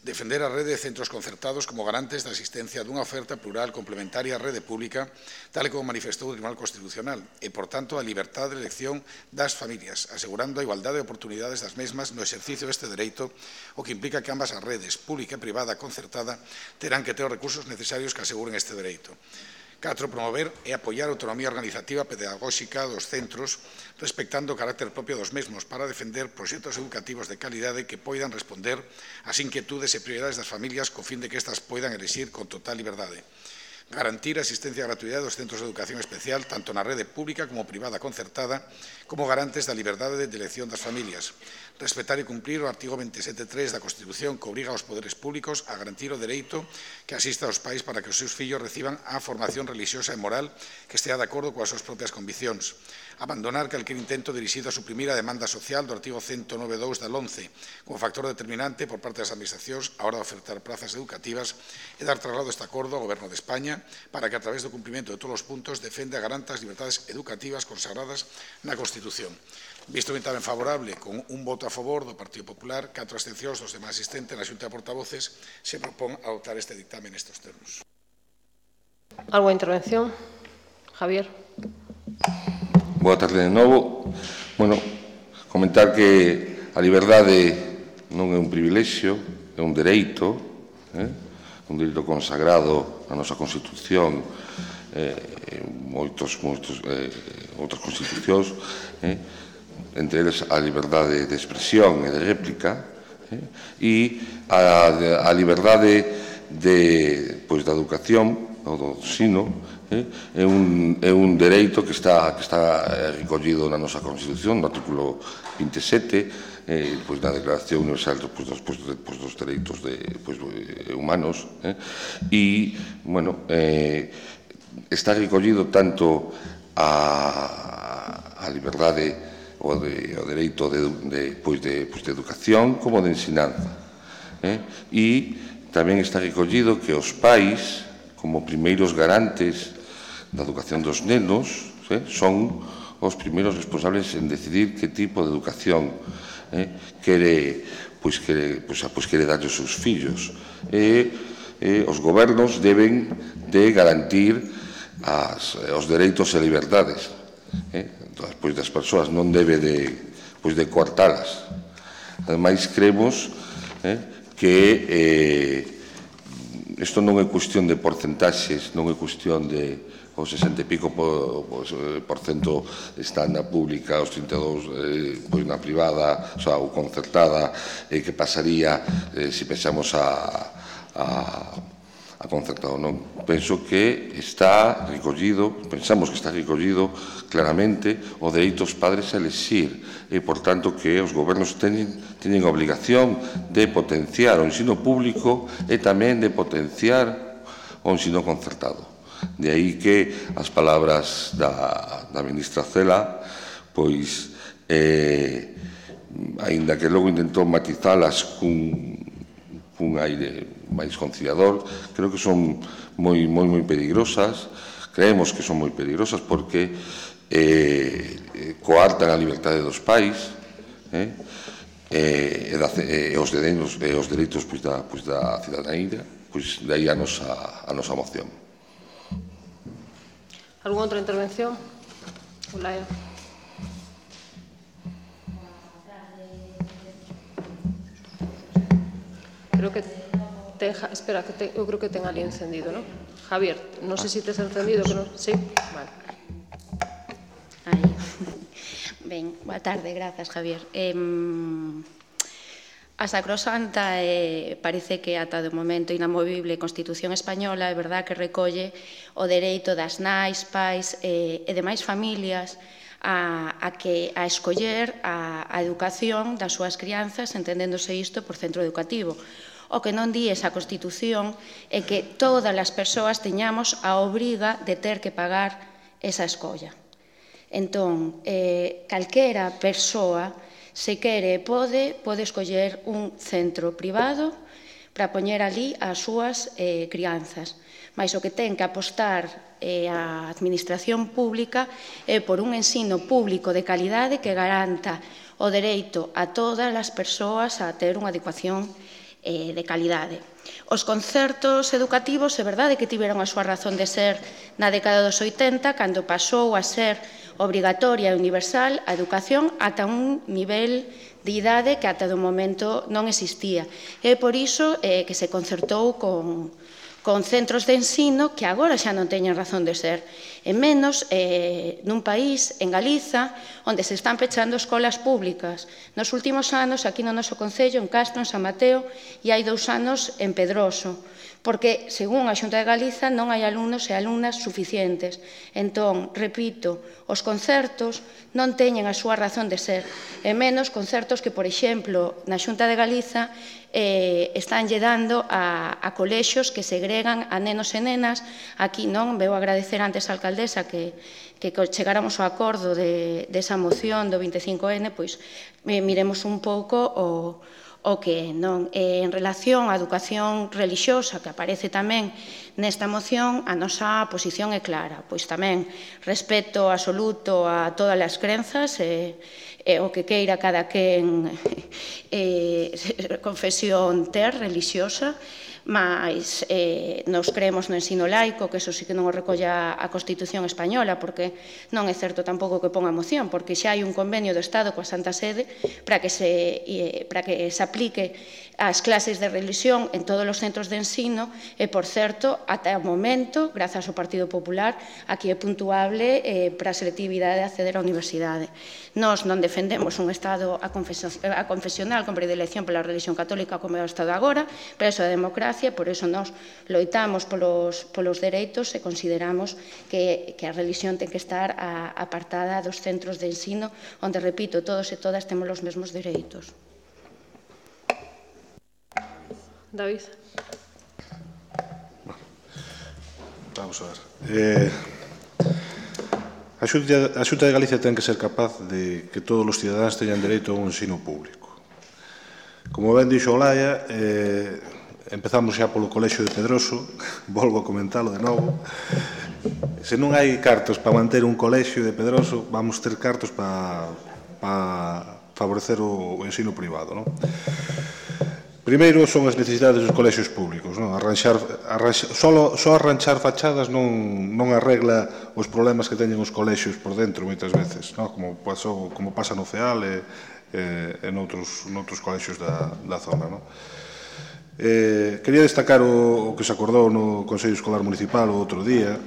Defender a rede de centros concertados como garantes da existencia dunha oferta plural complementaria á rede pública, tal e como manifestou o Tribunal Constitucional, e, por tanto, a liberdade de elección das familias, asegurando a igualdade de oportunidades das mesmas no exercicio deste dereito, o que implica que ambas as redes, pública e privada concertada, terán que ter os recursos necesarios que aseguren este dereito. catro. Promover e apoiar a autonomía organizativa pedagóxica dos centros, respectando o carácter propio dos mesmos para defender proxectos educativos de calidade que poidan responder ás inquietudes e prioridades das familias co fin de que estas poidan elixir con total liberdade. Garantir a asistencia e gratuidade dos centros de educación especial tanto na rede pública como privada concertada como garantes da liberdade de elección das familias. Respetar e cumprir o artigo veintisiete punto tres da Constitución que obriga aos poderes públicos a garantir o dereito que asista aos pais para que os seus fillos reciban a formación religiosa e moral que estea de acordo coas súas propias conviccións. Abandonar calquer intento dirixido a suprimir a demanda social do artigo ciento nove punto dous da LOMCE como factor determinante por parte das administracións a hora de ofertar plazas educativas e dar traslado deste acordo ao Goberno de España para que a través do cumprimento de todos os puntos defenda e garanta as libertades educativas consagradas na Constitución. Visto o dictamen favorable con un voto a favor do Partido Popular, catro abstencións dos demais asistentes na Xunta de Portavoces, se propón adoptar este dictamen nestes termos. Alguna intervención? Javier. Boa tarde de novo. Bueno, comentar que a liberdade non é un privilexio, é un dereito, eh? un dereito consagrado na nosa Constitución, eh, moitos, moitos, eh, outras constitucións, eh? entre eles a liberdade de expresión e de réplica, eh? e a, a liberdade de, pois, da educación, ou do ensino, eh? é, un, é un dereito que está, que está recollido na nosa Constitución, no artículo veintisiete, eh, pois, na Declaración Universal pois, dos, pois, pois, dos Dereitos de, pois, Humanos, eh? e, bueno, eh, está recollido tanto a, a liberdade o, de, o dereito de, de, pois de, pois de educación como de ensinanza. Eh? E tamén está recollido que os pais, como primeiros garantes da educación dos nenos, eh? son os primeiros responsables en decidir que tipo de educación eh? quere, pois quere, pois, pois quere darlle aos seus fillos. E eh, os gobernos deben de garantir as, os dereitos e liberdades eh? pois das persoas, non debe de, pois de coartalas. Ademais, creemos eh, que eh, isto non é cuestión de porcentaxes, non é cuestión de o sesenta e pico por, por cento está na pública, os trinta e dous eh, pois na privada, o sea, ou concertada, eh, que pasaría eh, se pensamos a, a a concertado, non? Penso que está recollido, pensamos que está recollido claramente o dereito dos padres a elexir e, por tanto, que os gobernos teñen, teñen a obligación de potenciar o ensino público e tamén de potenciar o ensino concertado. De aí que as palabras da, da ministra Cela, pois, eh, aínda que logo intentou matizalas cun, cun aire máis conciliador, creo que son moi, moi, moi peligrosas, creemos que son moi peligrosas porque eh, coartan a liberdade dos pais eh, e, e, e os dereitos, e os dereitos pois, da, pois, da cidadanía, pois de aí a nosa, a nosa moción. Alguna outra intervención? Olaya. Creo que ten, espera, que te, eu creo que ten ali encendido, non? Javier, non sei se tes encendido, que non, sí, vale. Aí. Ben, boa tarde, grazas, Javier. Eh, a Sacrosanta eh, parece que ata do momento inamovible Constitución Española é verdad que recolle o dereito das nais, pais eh, e demais familias a, a, que, a escoller a, a educación das súas crianzas, entendéndose isto por centro educativo. O que non di esa Constitución é que todas as persoas teñamos a obriga de ter que pagar esa escolla. Entón, eh, calquera persoa, se quere e pode, pode escoller un centro privado para poñer ali as súas eh, crianzas. Mais o que ten que apostar eh, a administración pública é por un ensino público de calidade que garanta o dereito a todas as persoas a ter unha educación eh, de calidade. Os concertos educativos é verdade que tiveron a súa razón de ser na década dos oitenta, cando pasou a ser obrigatoria e universal a educación ata un nivel de idade que ata do momento non existía. É por iso eh, que se concertou con, con centros de ensino que agora xa non teñen razón de ser. E menos eh, nun país, en Galiza, onde se están pechando escolas públicas. Nos últimos anos, aquí no noso Concello, en Castro, en San Mateo, e hai dous anos en Pedroso, porque, según a Xunta de Galiza, non hai alumnos e alumnas suficientes. Entón, repito, os concertos non teñen a súa razón de ser, e menos concertos que, por exemplo, na Xunta de Galiza eh, están lle dando a, a colexios que segregan a nenos e nenas. Aquí non, veu agradecer antes a alcaldesa que, que chegáramos ao acordo de, de esa moción do veinticinco ene, pois eh, miremos un pouco o o que non. Eh, en relación á educación relixiosa, que aparece tamén nesta moción, a nosa posición é clara. Pois tamén respeto absoluto a todas as crenzas, e, e o que queira cada quen eh, confesión ter relixiosa, mas eh, nos creemos no ensino laico, que eso sí que non o recolla a Constitución Española, porque non é certo tampouco que ponga moción, porque xa hai un convenio do Estado coa Santa Sede para que se, eh, para que se aplique as clases de religión en todos os centros de ensino, e, por certo, ata o momento, grazas ao Partido Popular, aquí é puntuable eh, para a selectividade de acceder á universidade. Nós non defendemos un Estado a confesional con predilección pola religión católica como é o Estado agora, pero eso é democracia, por eso nós loitamos polos, polos dereitos e consideramos que, que a religión ten que estar a, apartada dos centros de ensino, onde, repito, todos e todas temos os mesmos dereitos. David. Vamos a ver. Eh, a, Xunta, a Xunta de Galicia ten que ser capaz de que todos os cidadáns teñan dereito a un ensino público. Como ben dixo Olaya, eh, empezamos xa polo Colexio de Pedroso, volvo a comentalo de novo. Se non hai cartos para manter un colexio de Pedroso, vamos ter cartos para, para favorecer o, o ensino privado, non? Primeiro son as necesidades dos colexios públicos, non? Arranxar, arranxar, só, só arranxar fachadas non, non arregla os problemas que teñen os colexios por dentro moitas veces, non? Como, pasou, como pasa no CEAL e, e, e noutros, noutros colexios da, da zona, non? Eh, quería destacar o, o que se acordou no Consello Escolar Municipal o outro día,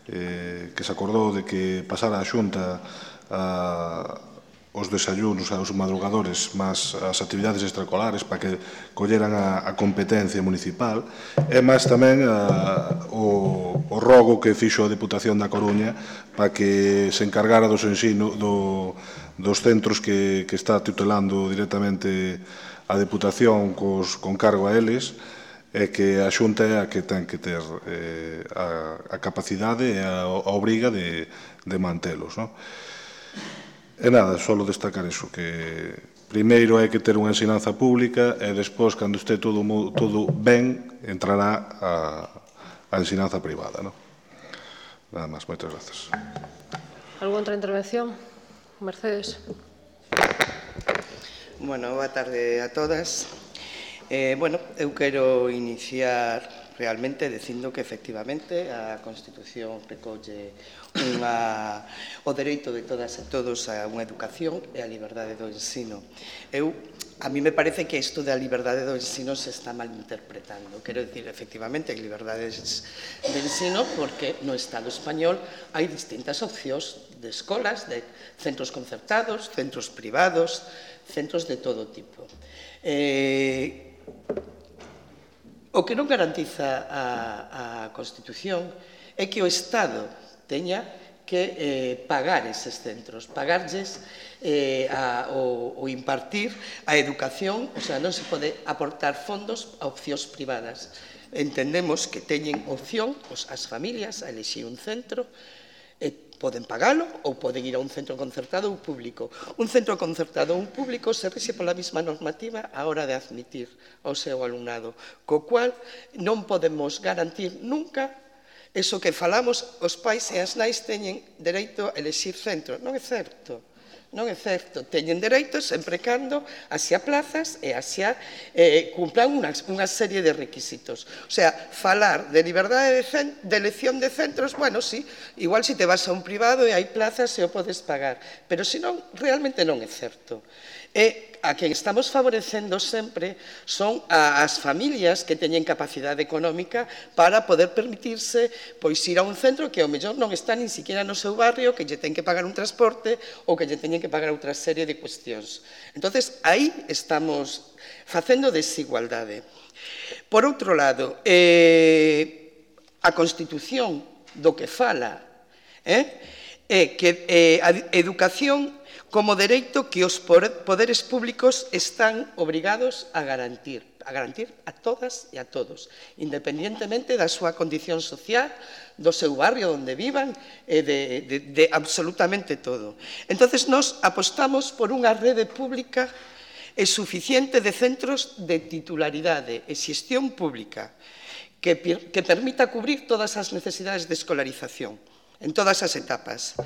eh, que se acordou de que pasara a Xunta a os desayunos aos madrugadores máis as actividades extracolares para que colleran a, a competencia municipal, e máis tamén a, o, o rogo que fixo a Deputación da Coruña para que se encargara dos ensino do, dos centros que, que está tutelando directamente a Deputación cos, con cargo a eles, e que a Xunta é a que ten que ter eh, a, a capacidade e a, a obriga de, de mantelos, non? E nada, só destacar eso, que primeiro hai que ter unha ensinanza pública e despois, cando este todo, todo ben, entrará a, a ensinanza privada, non? Nada máis, moitas grazas. Algún outra intervención? Mercedes. Bueno, boa tarde a todas. Eh, bueno, eu quero iniciar realmente dicindo que efectivamente a Constitución recolle unha, o dereito de todas e todos a unha educación e a liberdade do ensino. Eu, a mí me parece que isto da liberdade do ensino se está malinterpretando. Quero dicir, efectivamente, hai liberdades de ensino porque no Estado español hai distintas opcións de escolas, de centros concertados, centros privados, centros de todo tipo. Eh, o que non garantiza a, a Constitución é que o Estado teña que eh, pagar eses centros, pagarlles eh, a, o, o impartir a educación, o sea, non se pode aportar fondos a opcións privadas. Entendemos que teñen opción os, as familias a elexir un centro, e poden pagalo ou poden ir a un centro concertado ou público. Un centro concertado ou un público se rixe pola mesma normativa a hora de admitir ao seu alumnado, co cual non podemos garantir nunca eso que falamos, os pais e as nais teñen dereito a elexir centro. Non é certo. Non é certo. Teñen dereito sempre cando haxa plazas e haxa eh, cumplan unha, unha serie de requisitos. O sea, falar de liberdade de, de elección de centros, bueno, sí, igual se te vas a un privado e hai plazas e o podes pagar, pero senón, realmente non é certo. E a quen estamos favorecendo sempre son as familias que teñen capacidade económica para poder permitirse pois ir a un centro que ao mellor non está nin siquiera no seu barrio, que lle ten que pagar un transporte ou que lle teñen que pagar outra serie de cuestións. Entonces, aí estamos facendo desigualdade. Por outro lado, eh, a Constitución do que fala eh, é que eh, a educación como dereito que os poderes públicos están obrigados a garantir, a garantir a todas e a todos, independientemente da súa condición social, do seu barrio onde vivan e de, de, de absolutamente todo. Entonces, nós apostamos por unha rede pública e suficiente de centros de titularidade e xestión pública que, que permita cubrir todas as necesidades de escolarización en todas as etapas.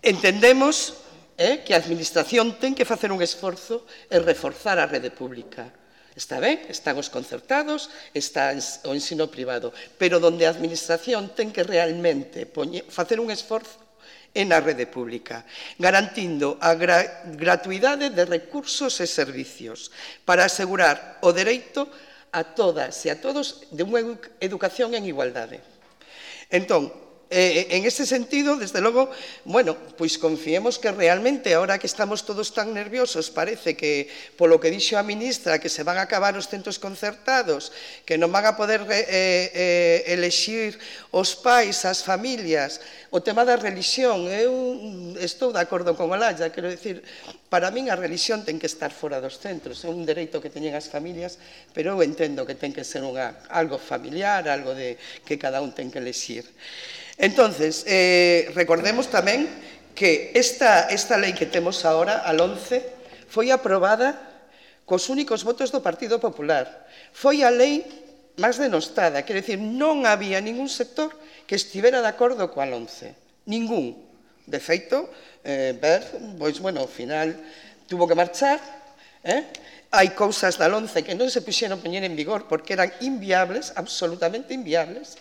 Entendemos Eh, que a Administración ten que facer un esforzo e reforzar a rede pública. Está ben, están os concertados, está o ensino privado, pero donde a Administración ten que realmente poñer, facer un esforzo en a rede pública, garantindo a gra gratuidade de recursos e servicios para asegurar o dereito a todas e a todos de unha educación en igualdade. Entón, Eh, en ese sentido, desde logo, bueno, pois confiemos que realmente, ahora que estamos todos tan nerviosos, parece que, polo que dixo a ministra, que se van a acabar os centros concertados, que non van a poder eh, eh, elexir os pais, as familias, o tema da religión. Eu estou de acordo con Olalla, quero dicir, para min a religión ten que estar fora dos centros, é un dereito que teñen as familias, pero eu entendo que ten que ser unha, algo familiar, algo de que cada un ten que elexir. Entonces, eh, recordemos tamén que esta, esta lei que temos agora, a LOMCE, foi aprobada cos únicos votos do Partido Popular. Foi a lei máis denostada, quer dizer, non había ningún sector que estivera de acordo coa LOMCE. Ningún. De feito, eh, ver, pois, bueno, ao final tuvo que marchar, eh? Hai cousas da LOMCE que non se puxeron poñer en vigor porque eran inviables, absolutamente inviables.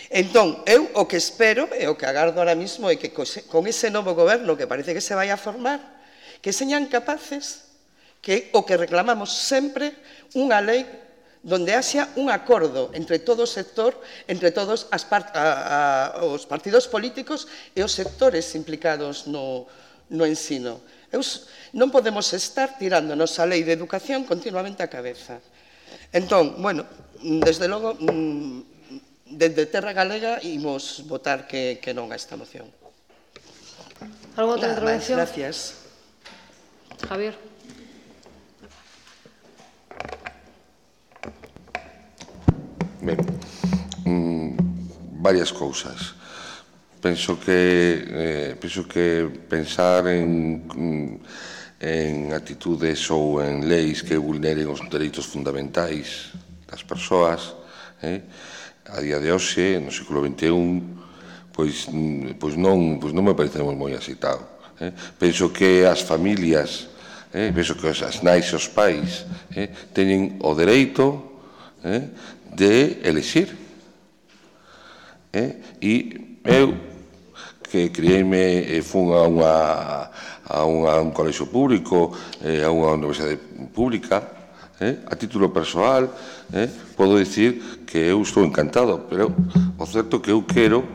Entón, eu o que espero e o que agardo ahora mismo é que con ese novo goberno que parece que se vai a formar, que señan capaces, que o que reclamamos sempre, unha lei donde haxa un acordo entre todo o sector, entre todos as part a, a, os partidos políticos e os sectores implicados no, no ensino. Eu, non podemos estar tirándonos a lei de educación continuamente a cabeza. Entón, bueno, desde logo, desde Terra Galega imos votar que, que non a esta moción. Algo outra intervención? Gracias. Javier. Ben, mm, varias cousas. Penso que, eh, penso que pensar en, en actitudes ou en leis que vulneren os dereitos fundamentais das persoas, eh, a día de hoxe, no século vinte e un, pois, pois, non, pois non me parecemos moi aceitado. Eh? Penso que as familias, eh, penso que as nais e os pais eh, teñen o dereito eh, de elexir. E eu, que criei-me e fun a unha a un colexio público, a unha universidade pública, a título persoal, podo dicir que eu estou encantado, pero o certo que eu quero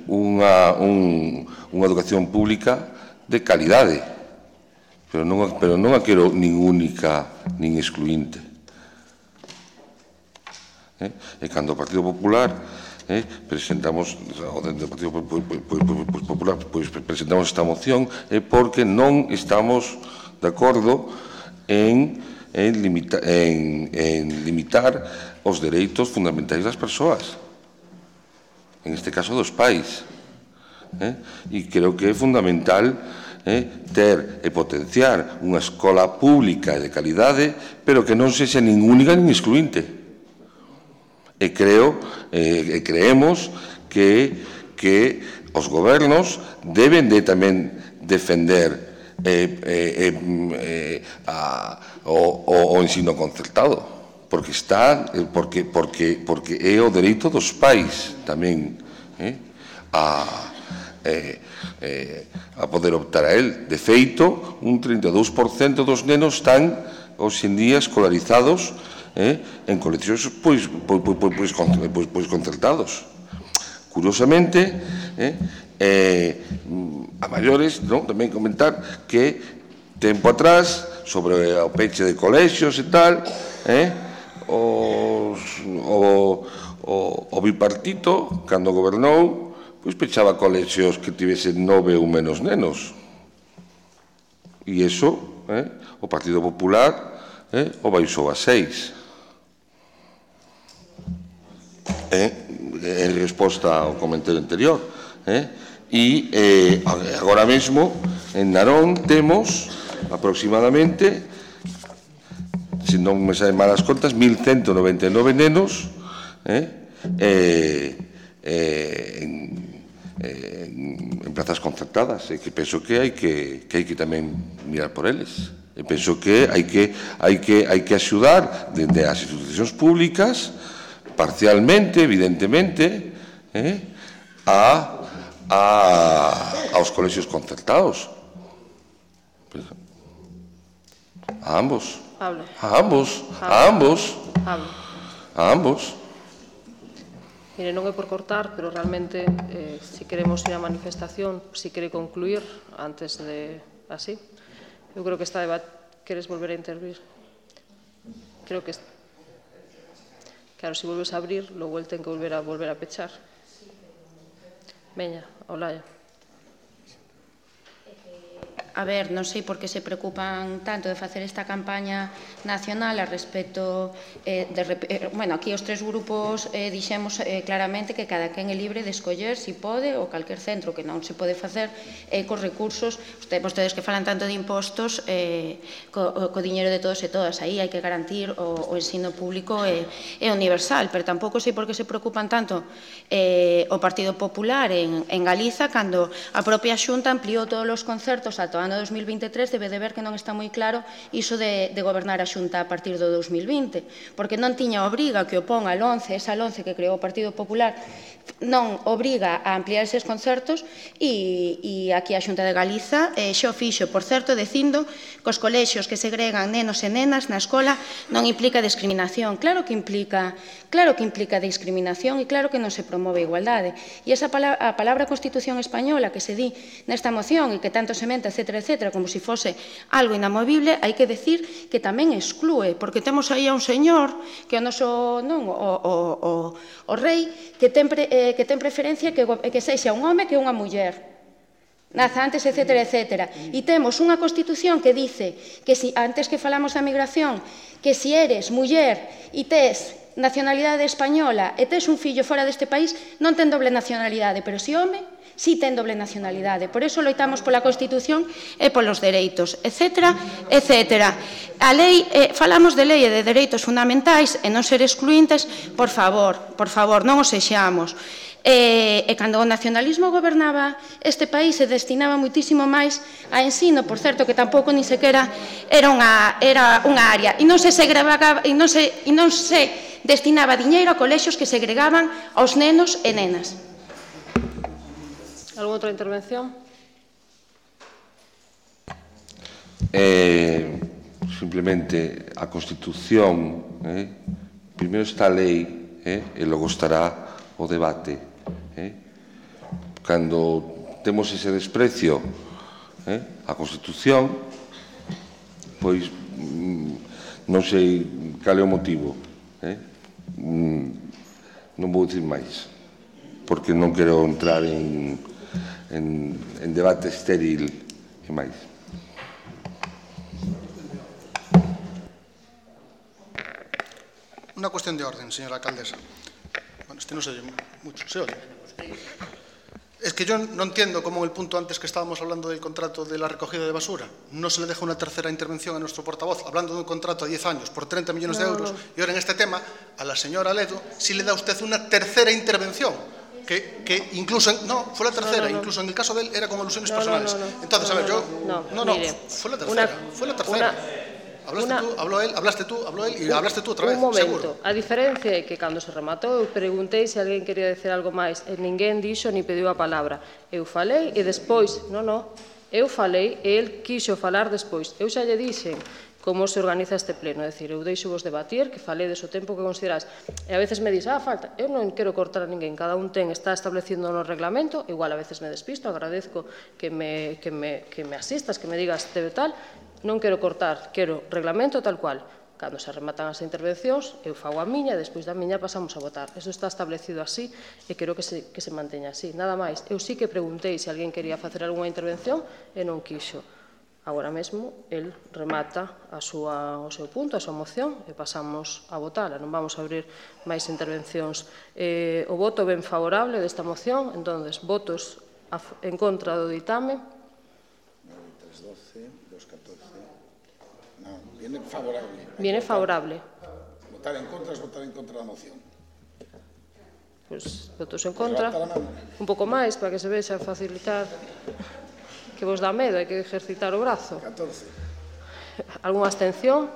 unha educación pública de calidade, pero non a quero nin única nin excluinte. E cando o Partido Popular presentamos o Partido Popular presentamos esta moción é porque non estamos de acordo en limitar os dereitos fundamentais das persoas, en este caso dos pais, e creo que é fundamental ter e potenciar unha escola pública de calidade, pero que non sexa nin única nin excluinte. E creo, e creemos que os gobernos deben de tamén defender o ensino concertado, porque está, porque é o dereito dos pais tamén a a poder optar a él. De feito, un trinta e dous por cento dos nenos están hoxe en día escolarizados en colexios concertados. Curiosamente, a maiores, tamén comentar que tempo atrás, sobre o peche de colexios e tal, o bipartito, cando gobernou, pois pechaba colexios que tivesen nove ou menos nenos. E iso, o Partido Popular o baixou a seis. En resposta ao comentario anterior. E agora mesmo en Narón temos aproximadamente, se non me saen malas contas, mil ciento noventa e nove nenos en plazas concertadas, e que penso que hai que tamén mirar por eles. E penso que hai que axudar dende as institucións públicas, parcialmente, evidentemente, aos colexios concertados. A ambos. A ambos. A ambos. A ambos. Mire, non é por cortar, pero realmente, se queremos ir á manifestación, se quere concluir antes de así, eu creo que está debate. Queres volver a intervir? Creo que... Claro, se volves a abrir, logo el ten que volver a volver a pechar. Veña, Olaya. A ver, non sei por que se preocupan tanto de facer esta campaña nacional a respecto de... Bueno, aquí os tres grupos dixemos claramente que cada quen é libre de escoller si pode ou calquer centro, que non se pode facer cos recursos. Vostedes que falan tanto de impostos, co diñeiro de todos e todas, aí hai que garantir o ensino público e universal, pero tampouco sei por que se preocupan tanto o Partido Popular en Galiza, cando a propia Xunta ampliou todos os concertos ata o ano dos mil vinte e tres, debe de ver que non está moi claro iso de gobernar a Xunta a partir do dos mil vinte, porque non tiña obriga que opón a LONCE, esa LONCE que creou o Partido Popular, non obriga a ampliar eses concertos, e aquí a Xunta de Galiza xa o fixo, por certo, dicindo que os colexios que segregan nenos e nenas na escola non implica discriminación. Claro que implica, claro que implica discriminación e claro que non se promove a igualdade. E esa a palabra Constitución Española que se di nesta moción e que tanto se menta, etcétera, etcétera, como se fose algo inamovible, hai que decir que tamén exclúe, porque temos aí a un señor que é o noso, non, o rei, que ten preferencia que sexa un home que unha muller. Nazantes, etcétera, etcétera. E temos unha Constitución que dice que si, antes que falamos da migración, que si eres muller e tes nacionalidade española e tes un fillo fora deste país, non ten doble nacionalidade, pero si home, si ten doble nacionalidade. Por iso loitamos pola Constitución e polos dereitos, etcétera, etcétera. A lei, falamos de lei e de dereitos fundamentais e non ser excluintes, por favor, por favor, non os sexamos. E cando o nacionalismo gobernaba este país se destinaba moitísimo máis a ensino, por certo, que tampouco ni sequera era unha área, e non se segregaba, e non se destinaba diñeiro a colexios que segregaban aos nenos e nenas. Alguna outra intervención? Eh, simplemente a Constitución, eh, primeiro está a lei eh, e logo estará o debate. Eh. Cando temos ese desprecio eh, a Constitución, pois mm, non sei cal é o motivo. Eh. Mm, non vou dicir máis, porque non quero entrar en En, en debate estéril e máis. Unha cuestión de orden, señora alcaldesa. Bueno, este non se oye mucho, se oye. Es que yo no entiendo cómo en el punto antes que estábamos hablando del contrato de la recogida de basura no se le deja una tercera intervención a nuestro portavoz hablando de un contrato a diez años por treinta millones no, de euros no. Y ahora en este tema a la señora Ledo sí le da usted una tercera intervención. Que, que incluso, en, no, fue la tercera, no, no, no. Incluso en el caso de él era con alusiones no, personales. No, no, no. Entonces, no, a ver, yo, no, no, no, mire, fue la tercera, una, fue la tercera. Una, hablaste una, tú, habló él, hablaste tú, habló él y un, hablaste tú outra vez, un momento, seguro. A diferencia é que cando se rematou, eu preguntei se alguén quería decir algo máis, e ninguén dixo ni pediu a palabra. Eu falei e despois, non, non, eu falei e el quixo falar despois. Eu xa lle dixen como se organiza este pleno, é dicir, eu deixo vos debatir, que faledes o tempo que consideráis. E a veces me dis, ah, falta, eu non quero cortar a ninguén, cada un ten, está estableciendo no reglamento, igual a veces me despisto, agradezco que me, que me, que me asistas, que me digas debe tal, non quero cortar, quero reglamento tal cual. Cando se rematan as intervencións, eu fago a miña e despois da miña pasamos a votar. Eso está establecido así e quero que se, que se manteña así. Nada máis, eu sí que preguntei se alguén quería facer algunha intervención e non quixo. Agora mesmo, el remata a súa, o seu punto, a súa moción, e pasamos a votala. Non vamos a abrir máis intervencións. Eh, o voto ben favorable desta moción, entón, votos a, en contra do ditame. tres, doce, dos, catorce. Non, viene favorable. Viene favorable. Votar en contra es votar en contra da moción. Pois, votos en contra. Un pouco máis, para que se vexa facilitar... Que vos dá medo, hai que ejercitar o brazo. catorce. Algúnha abstención?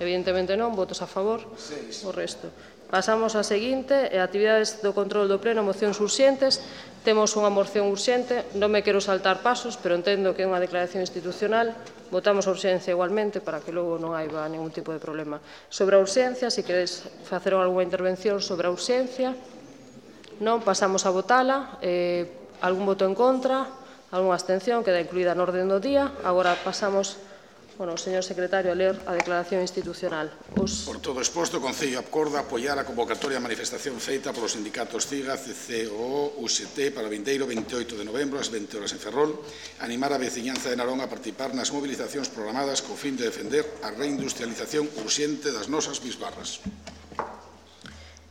Evidentemente non, votos a favor. seis. O resto. Pasamos á seguinte, e actividades do control do pleno, mocións urxentes. Temos unha moción urxente, non me quero saltar pasos, pero entendo que é unha declaración institucional. Votamos a urxencia igualmente, para que logo non haiba ningún tipo de problema. Sobre a urxencia, se queredes facer algunha intervención sobre a urxencia, non, pasamos a votala. Eh, algún voto en contra? Algúnha abstención, queda incluída no orden do día. Agora pasamos, bueno, o señor secretario a ler a declaración institucional. Os... Por todo exposto, o Concello acorda apoiar a convocatoria a manifestación feita polos sindicatos CIGA, C C O, U S T para o vindeiro veintioito de novembro ás vinte horas en Ferrol, animar a veciñanza de Narón a participar nas mobilizacións programadas co fin de defender a reindustrialización urxente das nosas bisbarras.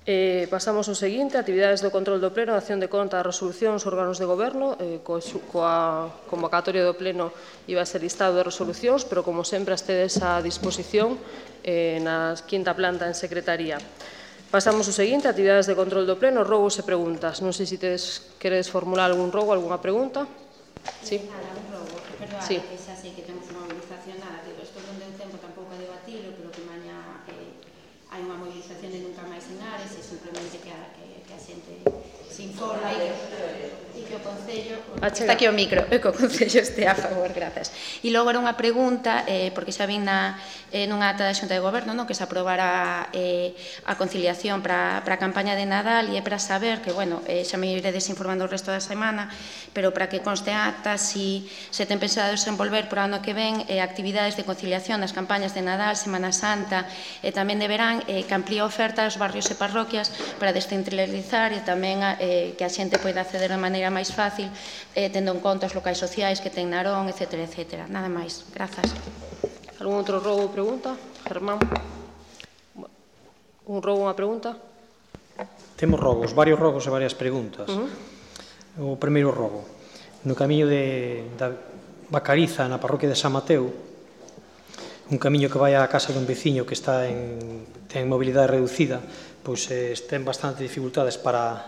Eh, pasamos ao seguinte, actividades do control do pleno, acción de conta das resolucións, órganos de goberno, eh, co, coa convocatoria do pleno iba a ser listado de resolucións, pero como sempre as tedes a disposición eh, na quinta planta en secretaría. Pasamos ao seguinte, actividades de control do pleno, rogos e preguntas. Non sei se tedes, queredes formular algún rogo, algunha pregunta. Sí. Nada, un rogo. Perdón, sí. Que xa sei que temos unha movilización, nada, digo, isto non deu tempo tampouco a debatilo, pero que maña eh, hai unha movilización de nunca máis en Ares e simplemente que a, que, que a xente se informa e que, e que o Concello... Está aquí o micro, e que o Concello este a favor, grazas. E logo era unha pregunta, eh, porque xa vin na, eh, nunha ata da Xunta de Goberno, no, que se aprobara eh, a conciliación para, para a campaña de Nadal, e é para saber que, bueno, eh, xa me iredes informando o resto da semana, pero para que conste acta, si se ten pensado desenvolver por ano que ven eh, actividades de conciliación nas campañas de Nadal, Semana Santa e tamén de verán, eh, que amplía a oferta aos barrios e parroquias para descentralizar e tamén eh, que a xente poida acceder de maneira máis fácil, eh, tendo en conta os locais sociais que ten Narón, etcétera, etcétera. Nada máis. Grazas. Algún outro rogo ou pregunta? Germán? Un rogo ou unha pregunta? Temos rogos, varios rogos e varias preguntas. Uh -huh. O primeiro rogo. No camiño de, da Bacariza, na parroquia de San Mateo, un camiño que vai á casa dun veciño que está en, ten mobilidade reducida, pois eh, ten bastante dificultades para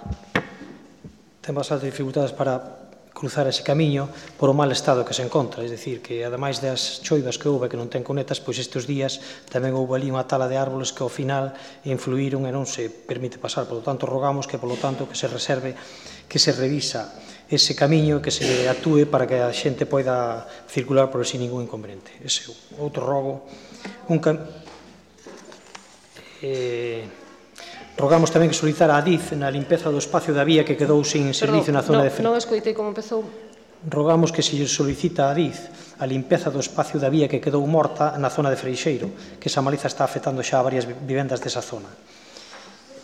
ten bastante dificultades para cruzar ese camiño por o mal estado que se encontra, é dicir, que ademais das choivas que houve que non ten conetas, pois estes días tamén houve ali unha tala de árboles que ao final influíron e non se permite pasar, por lo tanto rogamos que polo tanto que se reserve, que se revisa ese camiño, que se atúe para que a xente poida circular por sin ningún inconveniente. Ese outro rogo, un cam... eh... Rogamos tamén que solicitara a Adif na limpeza do espacio da vía que quedou sin servicio na zona de Ferrol. Non escoitei como empezou. Rogamos que se solicita a Adif a limpeza do espacio da vía que quedou morta na zona de Freixeiro, que esa maliza está afectando xa a varias vivendas desa zona.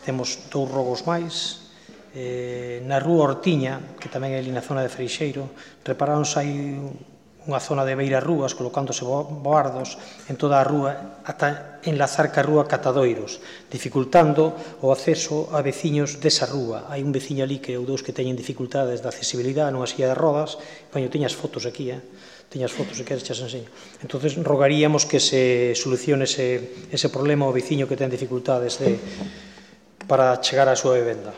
Temos dous rogos máis. Eh, na rúa Ortiña, que tamén é ali na zona de Freixeiro, repararonse aí unha zona de beira rúas, colocándose boardos en toda a rúa, ata enlazar ca rúa Catadoiros, dificultando o acceso a veciños desa rúa. Hai un veciño ali que ou dous que teñen dificultades de accesibilidade nunha silla de rodas. Poño, teñas fotos aquí, eh? Teñas fotos, se queres, xas enseño. Entón, rogaríamos que se solucione ese, ese problema ao veciño que ten dificultades de, para chegar á súa vivenda.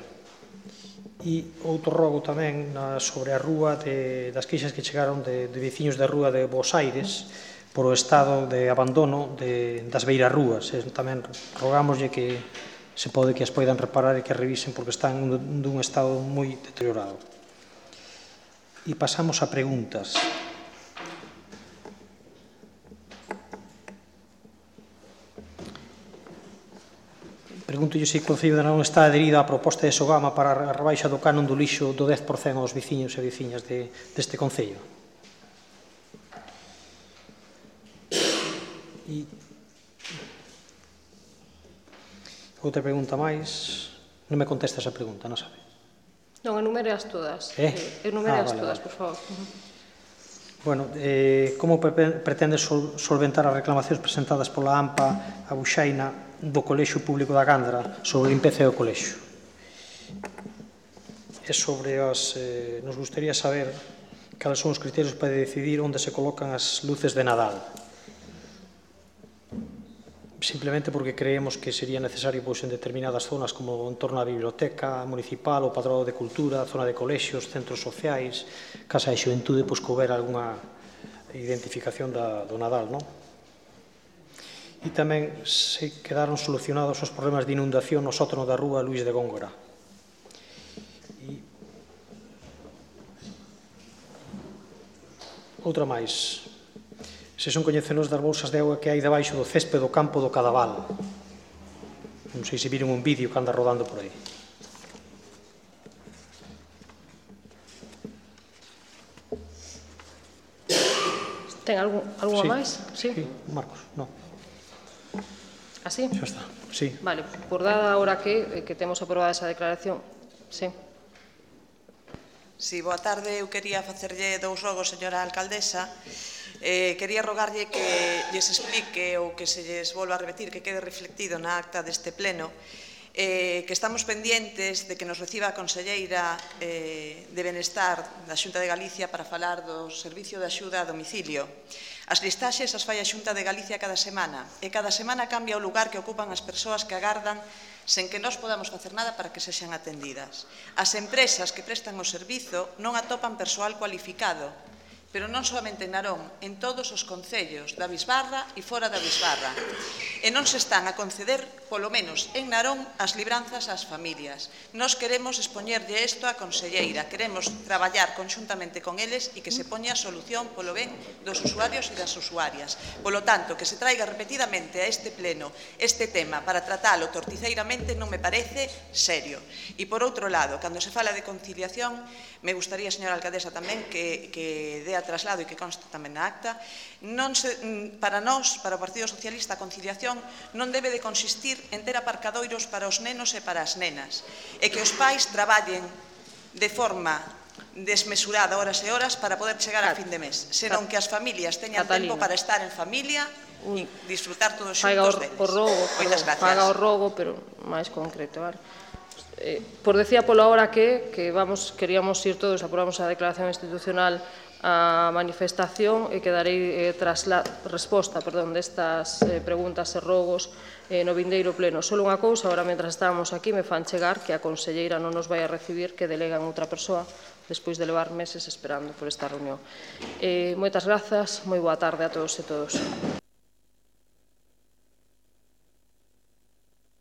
E outro rogo tamén na, sobre a rúa de, das queixas que chegaron de, de veciños da rúa de Bos Aires por o estado de abandono de, das beiras rúas. E tamén rogámoslle que se pode que as poidan reparar e que revisen porque están dun estado moi deteriorado. E pasamos a preguntas. Pregunto se o Concello de Narón está adherido á proposta de Sogama para a rebaixa do canon do lixo do dez por cento aos veciños e veciñas de, deste Concello. E outra pregunta máis. Non me contesta esa pregunta, non sabe? Non, enumere as todas. Eh? Enumere Ah, as vale, todas, vale. por favor. Bueno, eh, como pretende sol, solventar as reclamacións presentadas pola AMPA a Buxaina do Colexio Público da Gandra sobre a limpeza do colexio? E sobre as... Eh, nos gustaría saber cales son os criterios para decidir onde se colocan as luces de Nadal. Simplemente porque creemos que sería necesario pois, en determinadas zonas como en torno á biblioteca municipal, o padrón de cultura, a zona de colexios, centros sociais, casa de xuventude, pois que houbera algunha identificación da, do Nadal, non? E tamén se quedaron solucionados os problemas de inundación no sótano da rúa Luís de Góngora. E outra máis. Se son coñecenos das bolsas de auga que hai debaixo do céspede do campo do Cadaval. Non sei se viron un vídeo que anda rodando por aí. Ten algún, algunha Sí. máis? Sí. Sí, Marcos, non. Así? Xa está, sí. Vale, por dada ahora que, que temos aprobada esa declaración. Sí. Sí, boa tarde. Eu quería facerlle dous rogos, señora alcaldesa. Eh, quería rogarlle que lles explique ou que se lles volva a repetir, que quede reflectido na acta deste pleno, eh, que estamos pendientes de que nos reciba a conselleira eh, de Benestar da Xunta de Galicia para falar do servicio de axuda a domicilio. As listaxes as fai a Xunta de Galicia cada semana e cada semana cambia o lugar que ocupan as persoas que agardan sen que nós podamos facer nada para que sexan atendidas. As empresas que prestan o servizo non atopan persoal cualificado, pero non somente en Narón, en todos os concellos da Bisbarra e fora da Bisbarra. E non se están a conceder, polo menos en Narón, as libranzas ás familias. Nos queremos expoñerlle isto á conselleira, queremos traballar conxuntamente con eles e que se poña a solución polo ben dos usuarios e das usuarias. Polo tanto, que se traiga repetidamente a este pleno este tema para tratalo torticeiramente non me parece serio. E por outro lado, cando se fala de conciliación, me gustaría, señora alcaldesa, tamén que, que dé a traslado e que conste tamén na acta, non se, para nós, para o Partido Socialista, a conciliación non debe de consistir en ter aparcadoiros para os nenos e para as nenas, e que os pais traballen de forma desmesurada horas e horas para poder chegar a fin de mes, senón que as familias teñan tempo para estar en familia e disfrutar todos xuntos deles. O rogo, Moitas gracias. paga o rogo, pero máis concreto, vale? Eh, por decía polo hora que, que vamos, queríamos ir todos, aprobamos a declaración institucional a manifestación e que darei eh, trasla, resposta perdón, destas eh, preguntas e rogos eh, no vindeiro pleno. Solo unha cousa, agora, mentras estábamos aquí, me fan chegar que a conselleira non nos vai a recibir, que delegan outra persoa, despois de levar meses esperando por esta reunión. Eh, moitas grazas, moi boa tarde a todos e todos.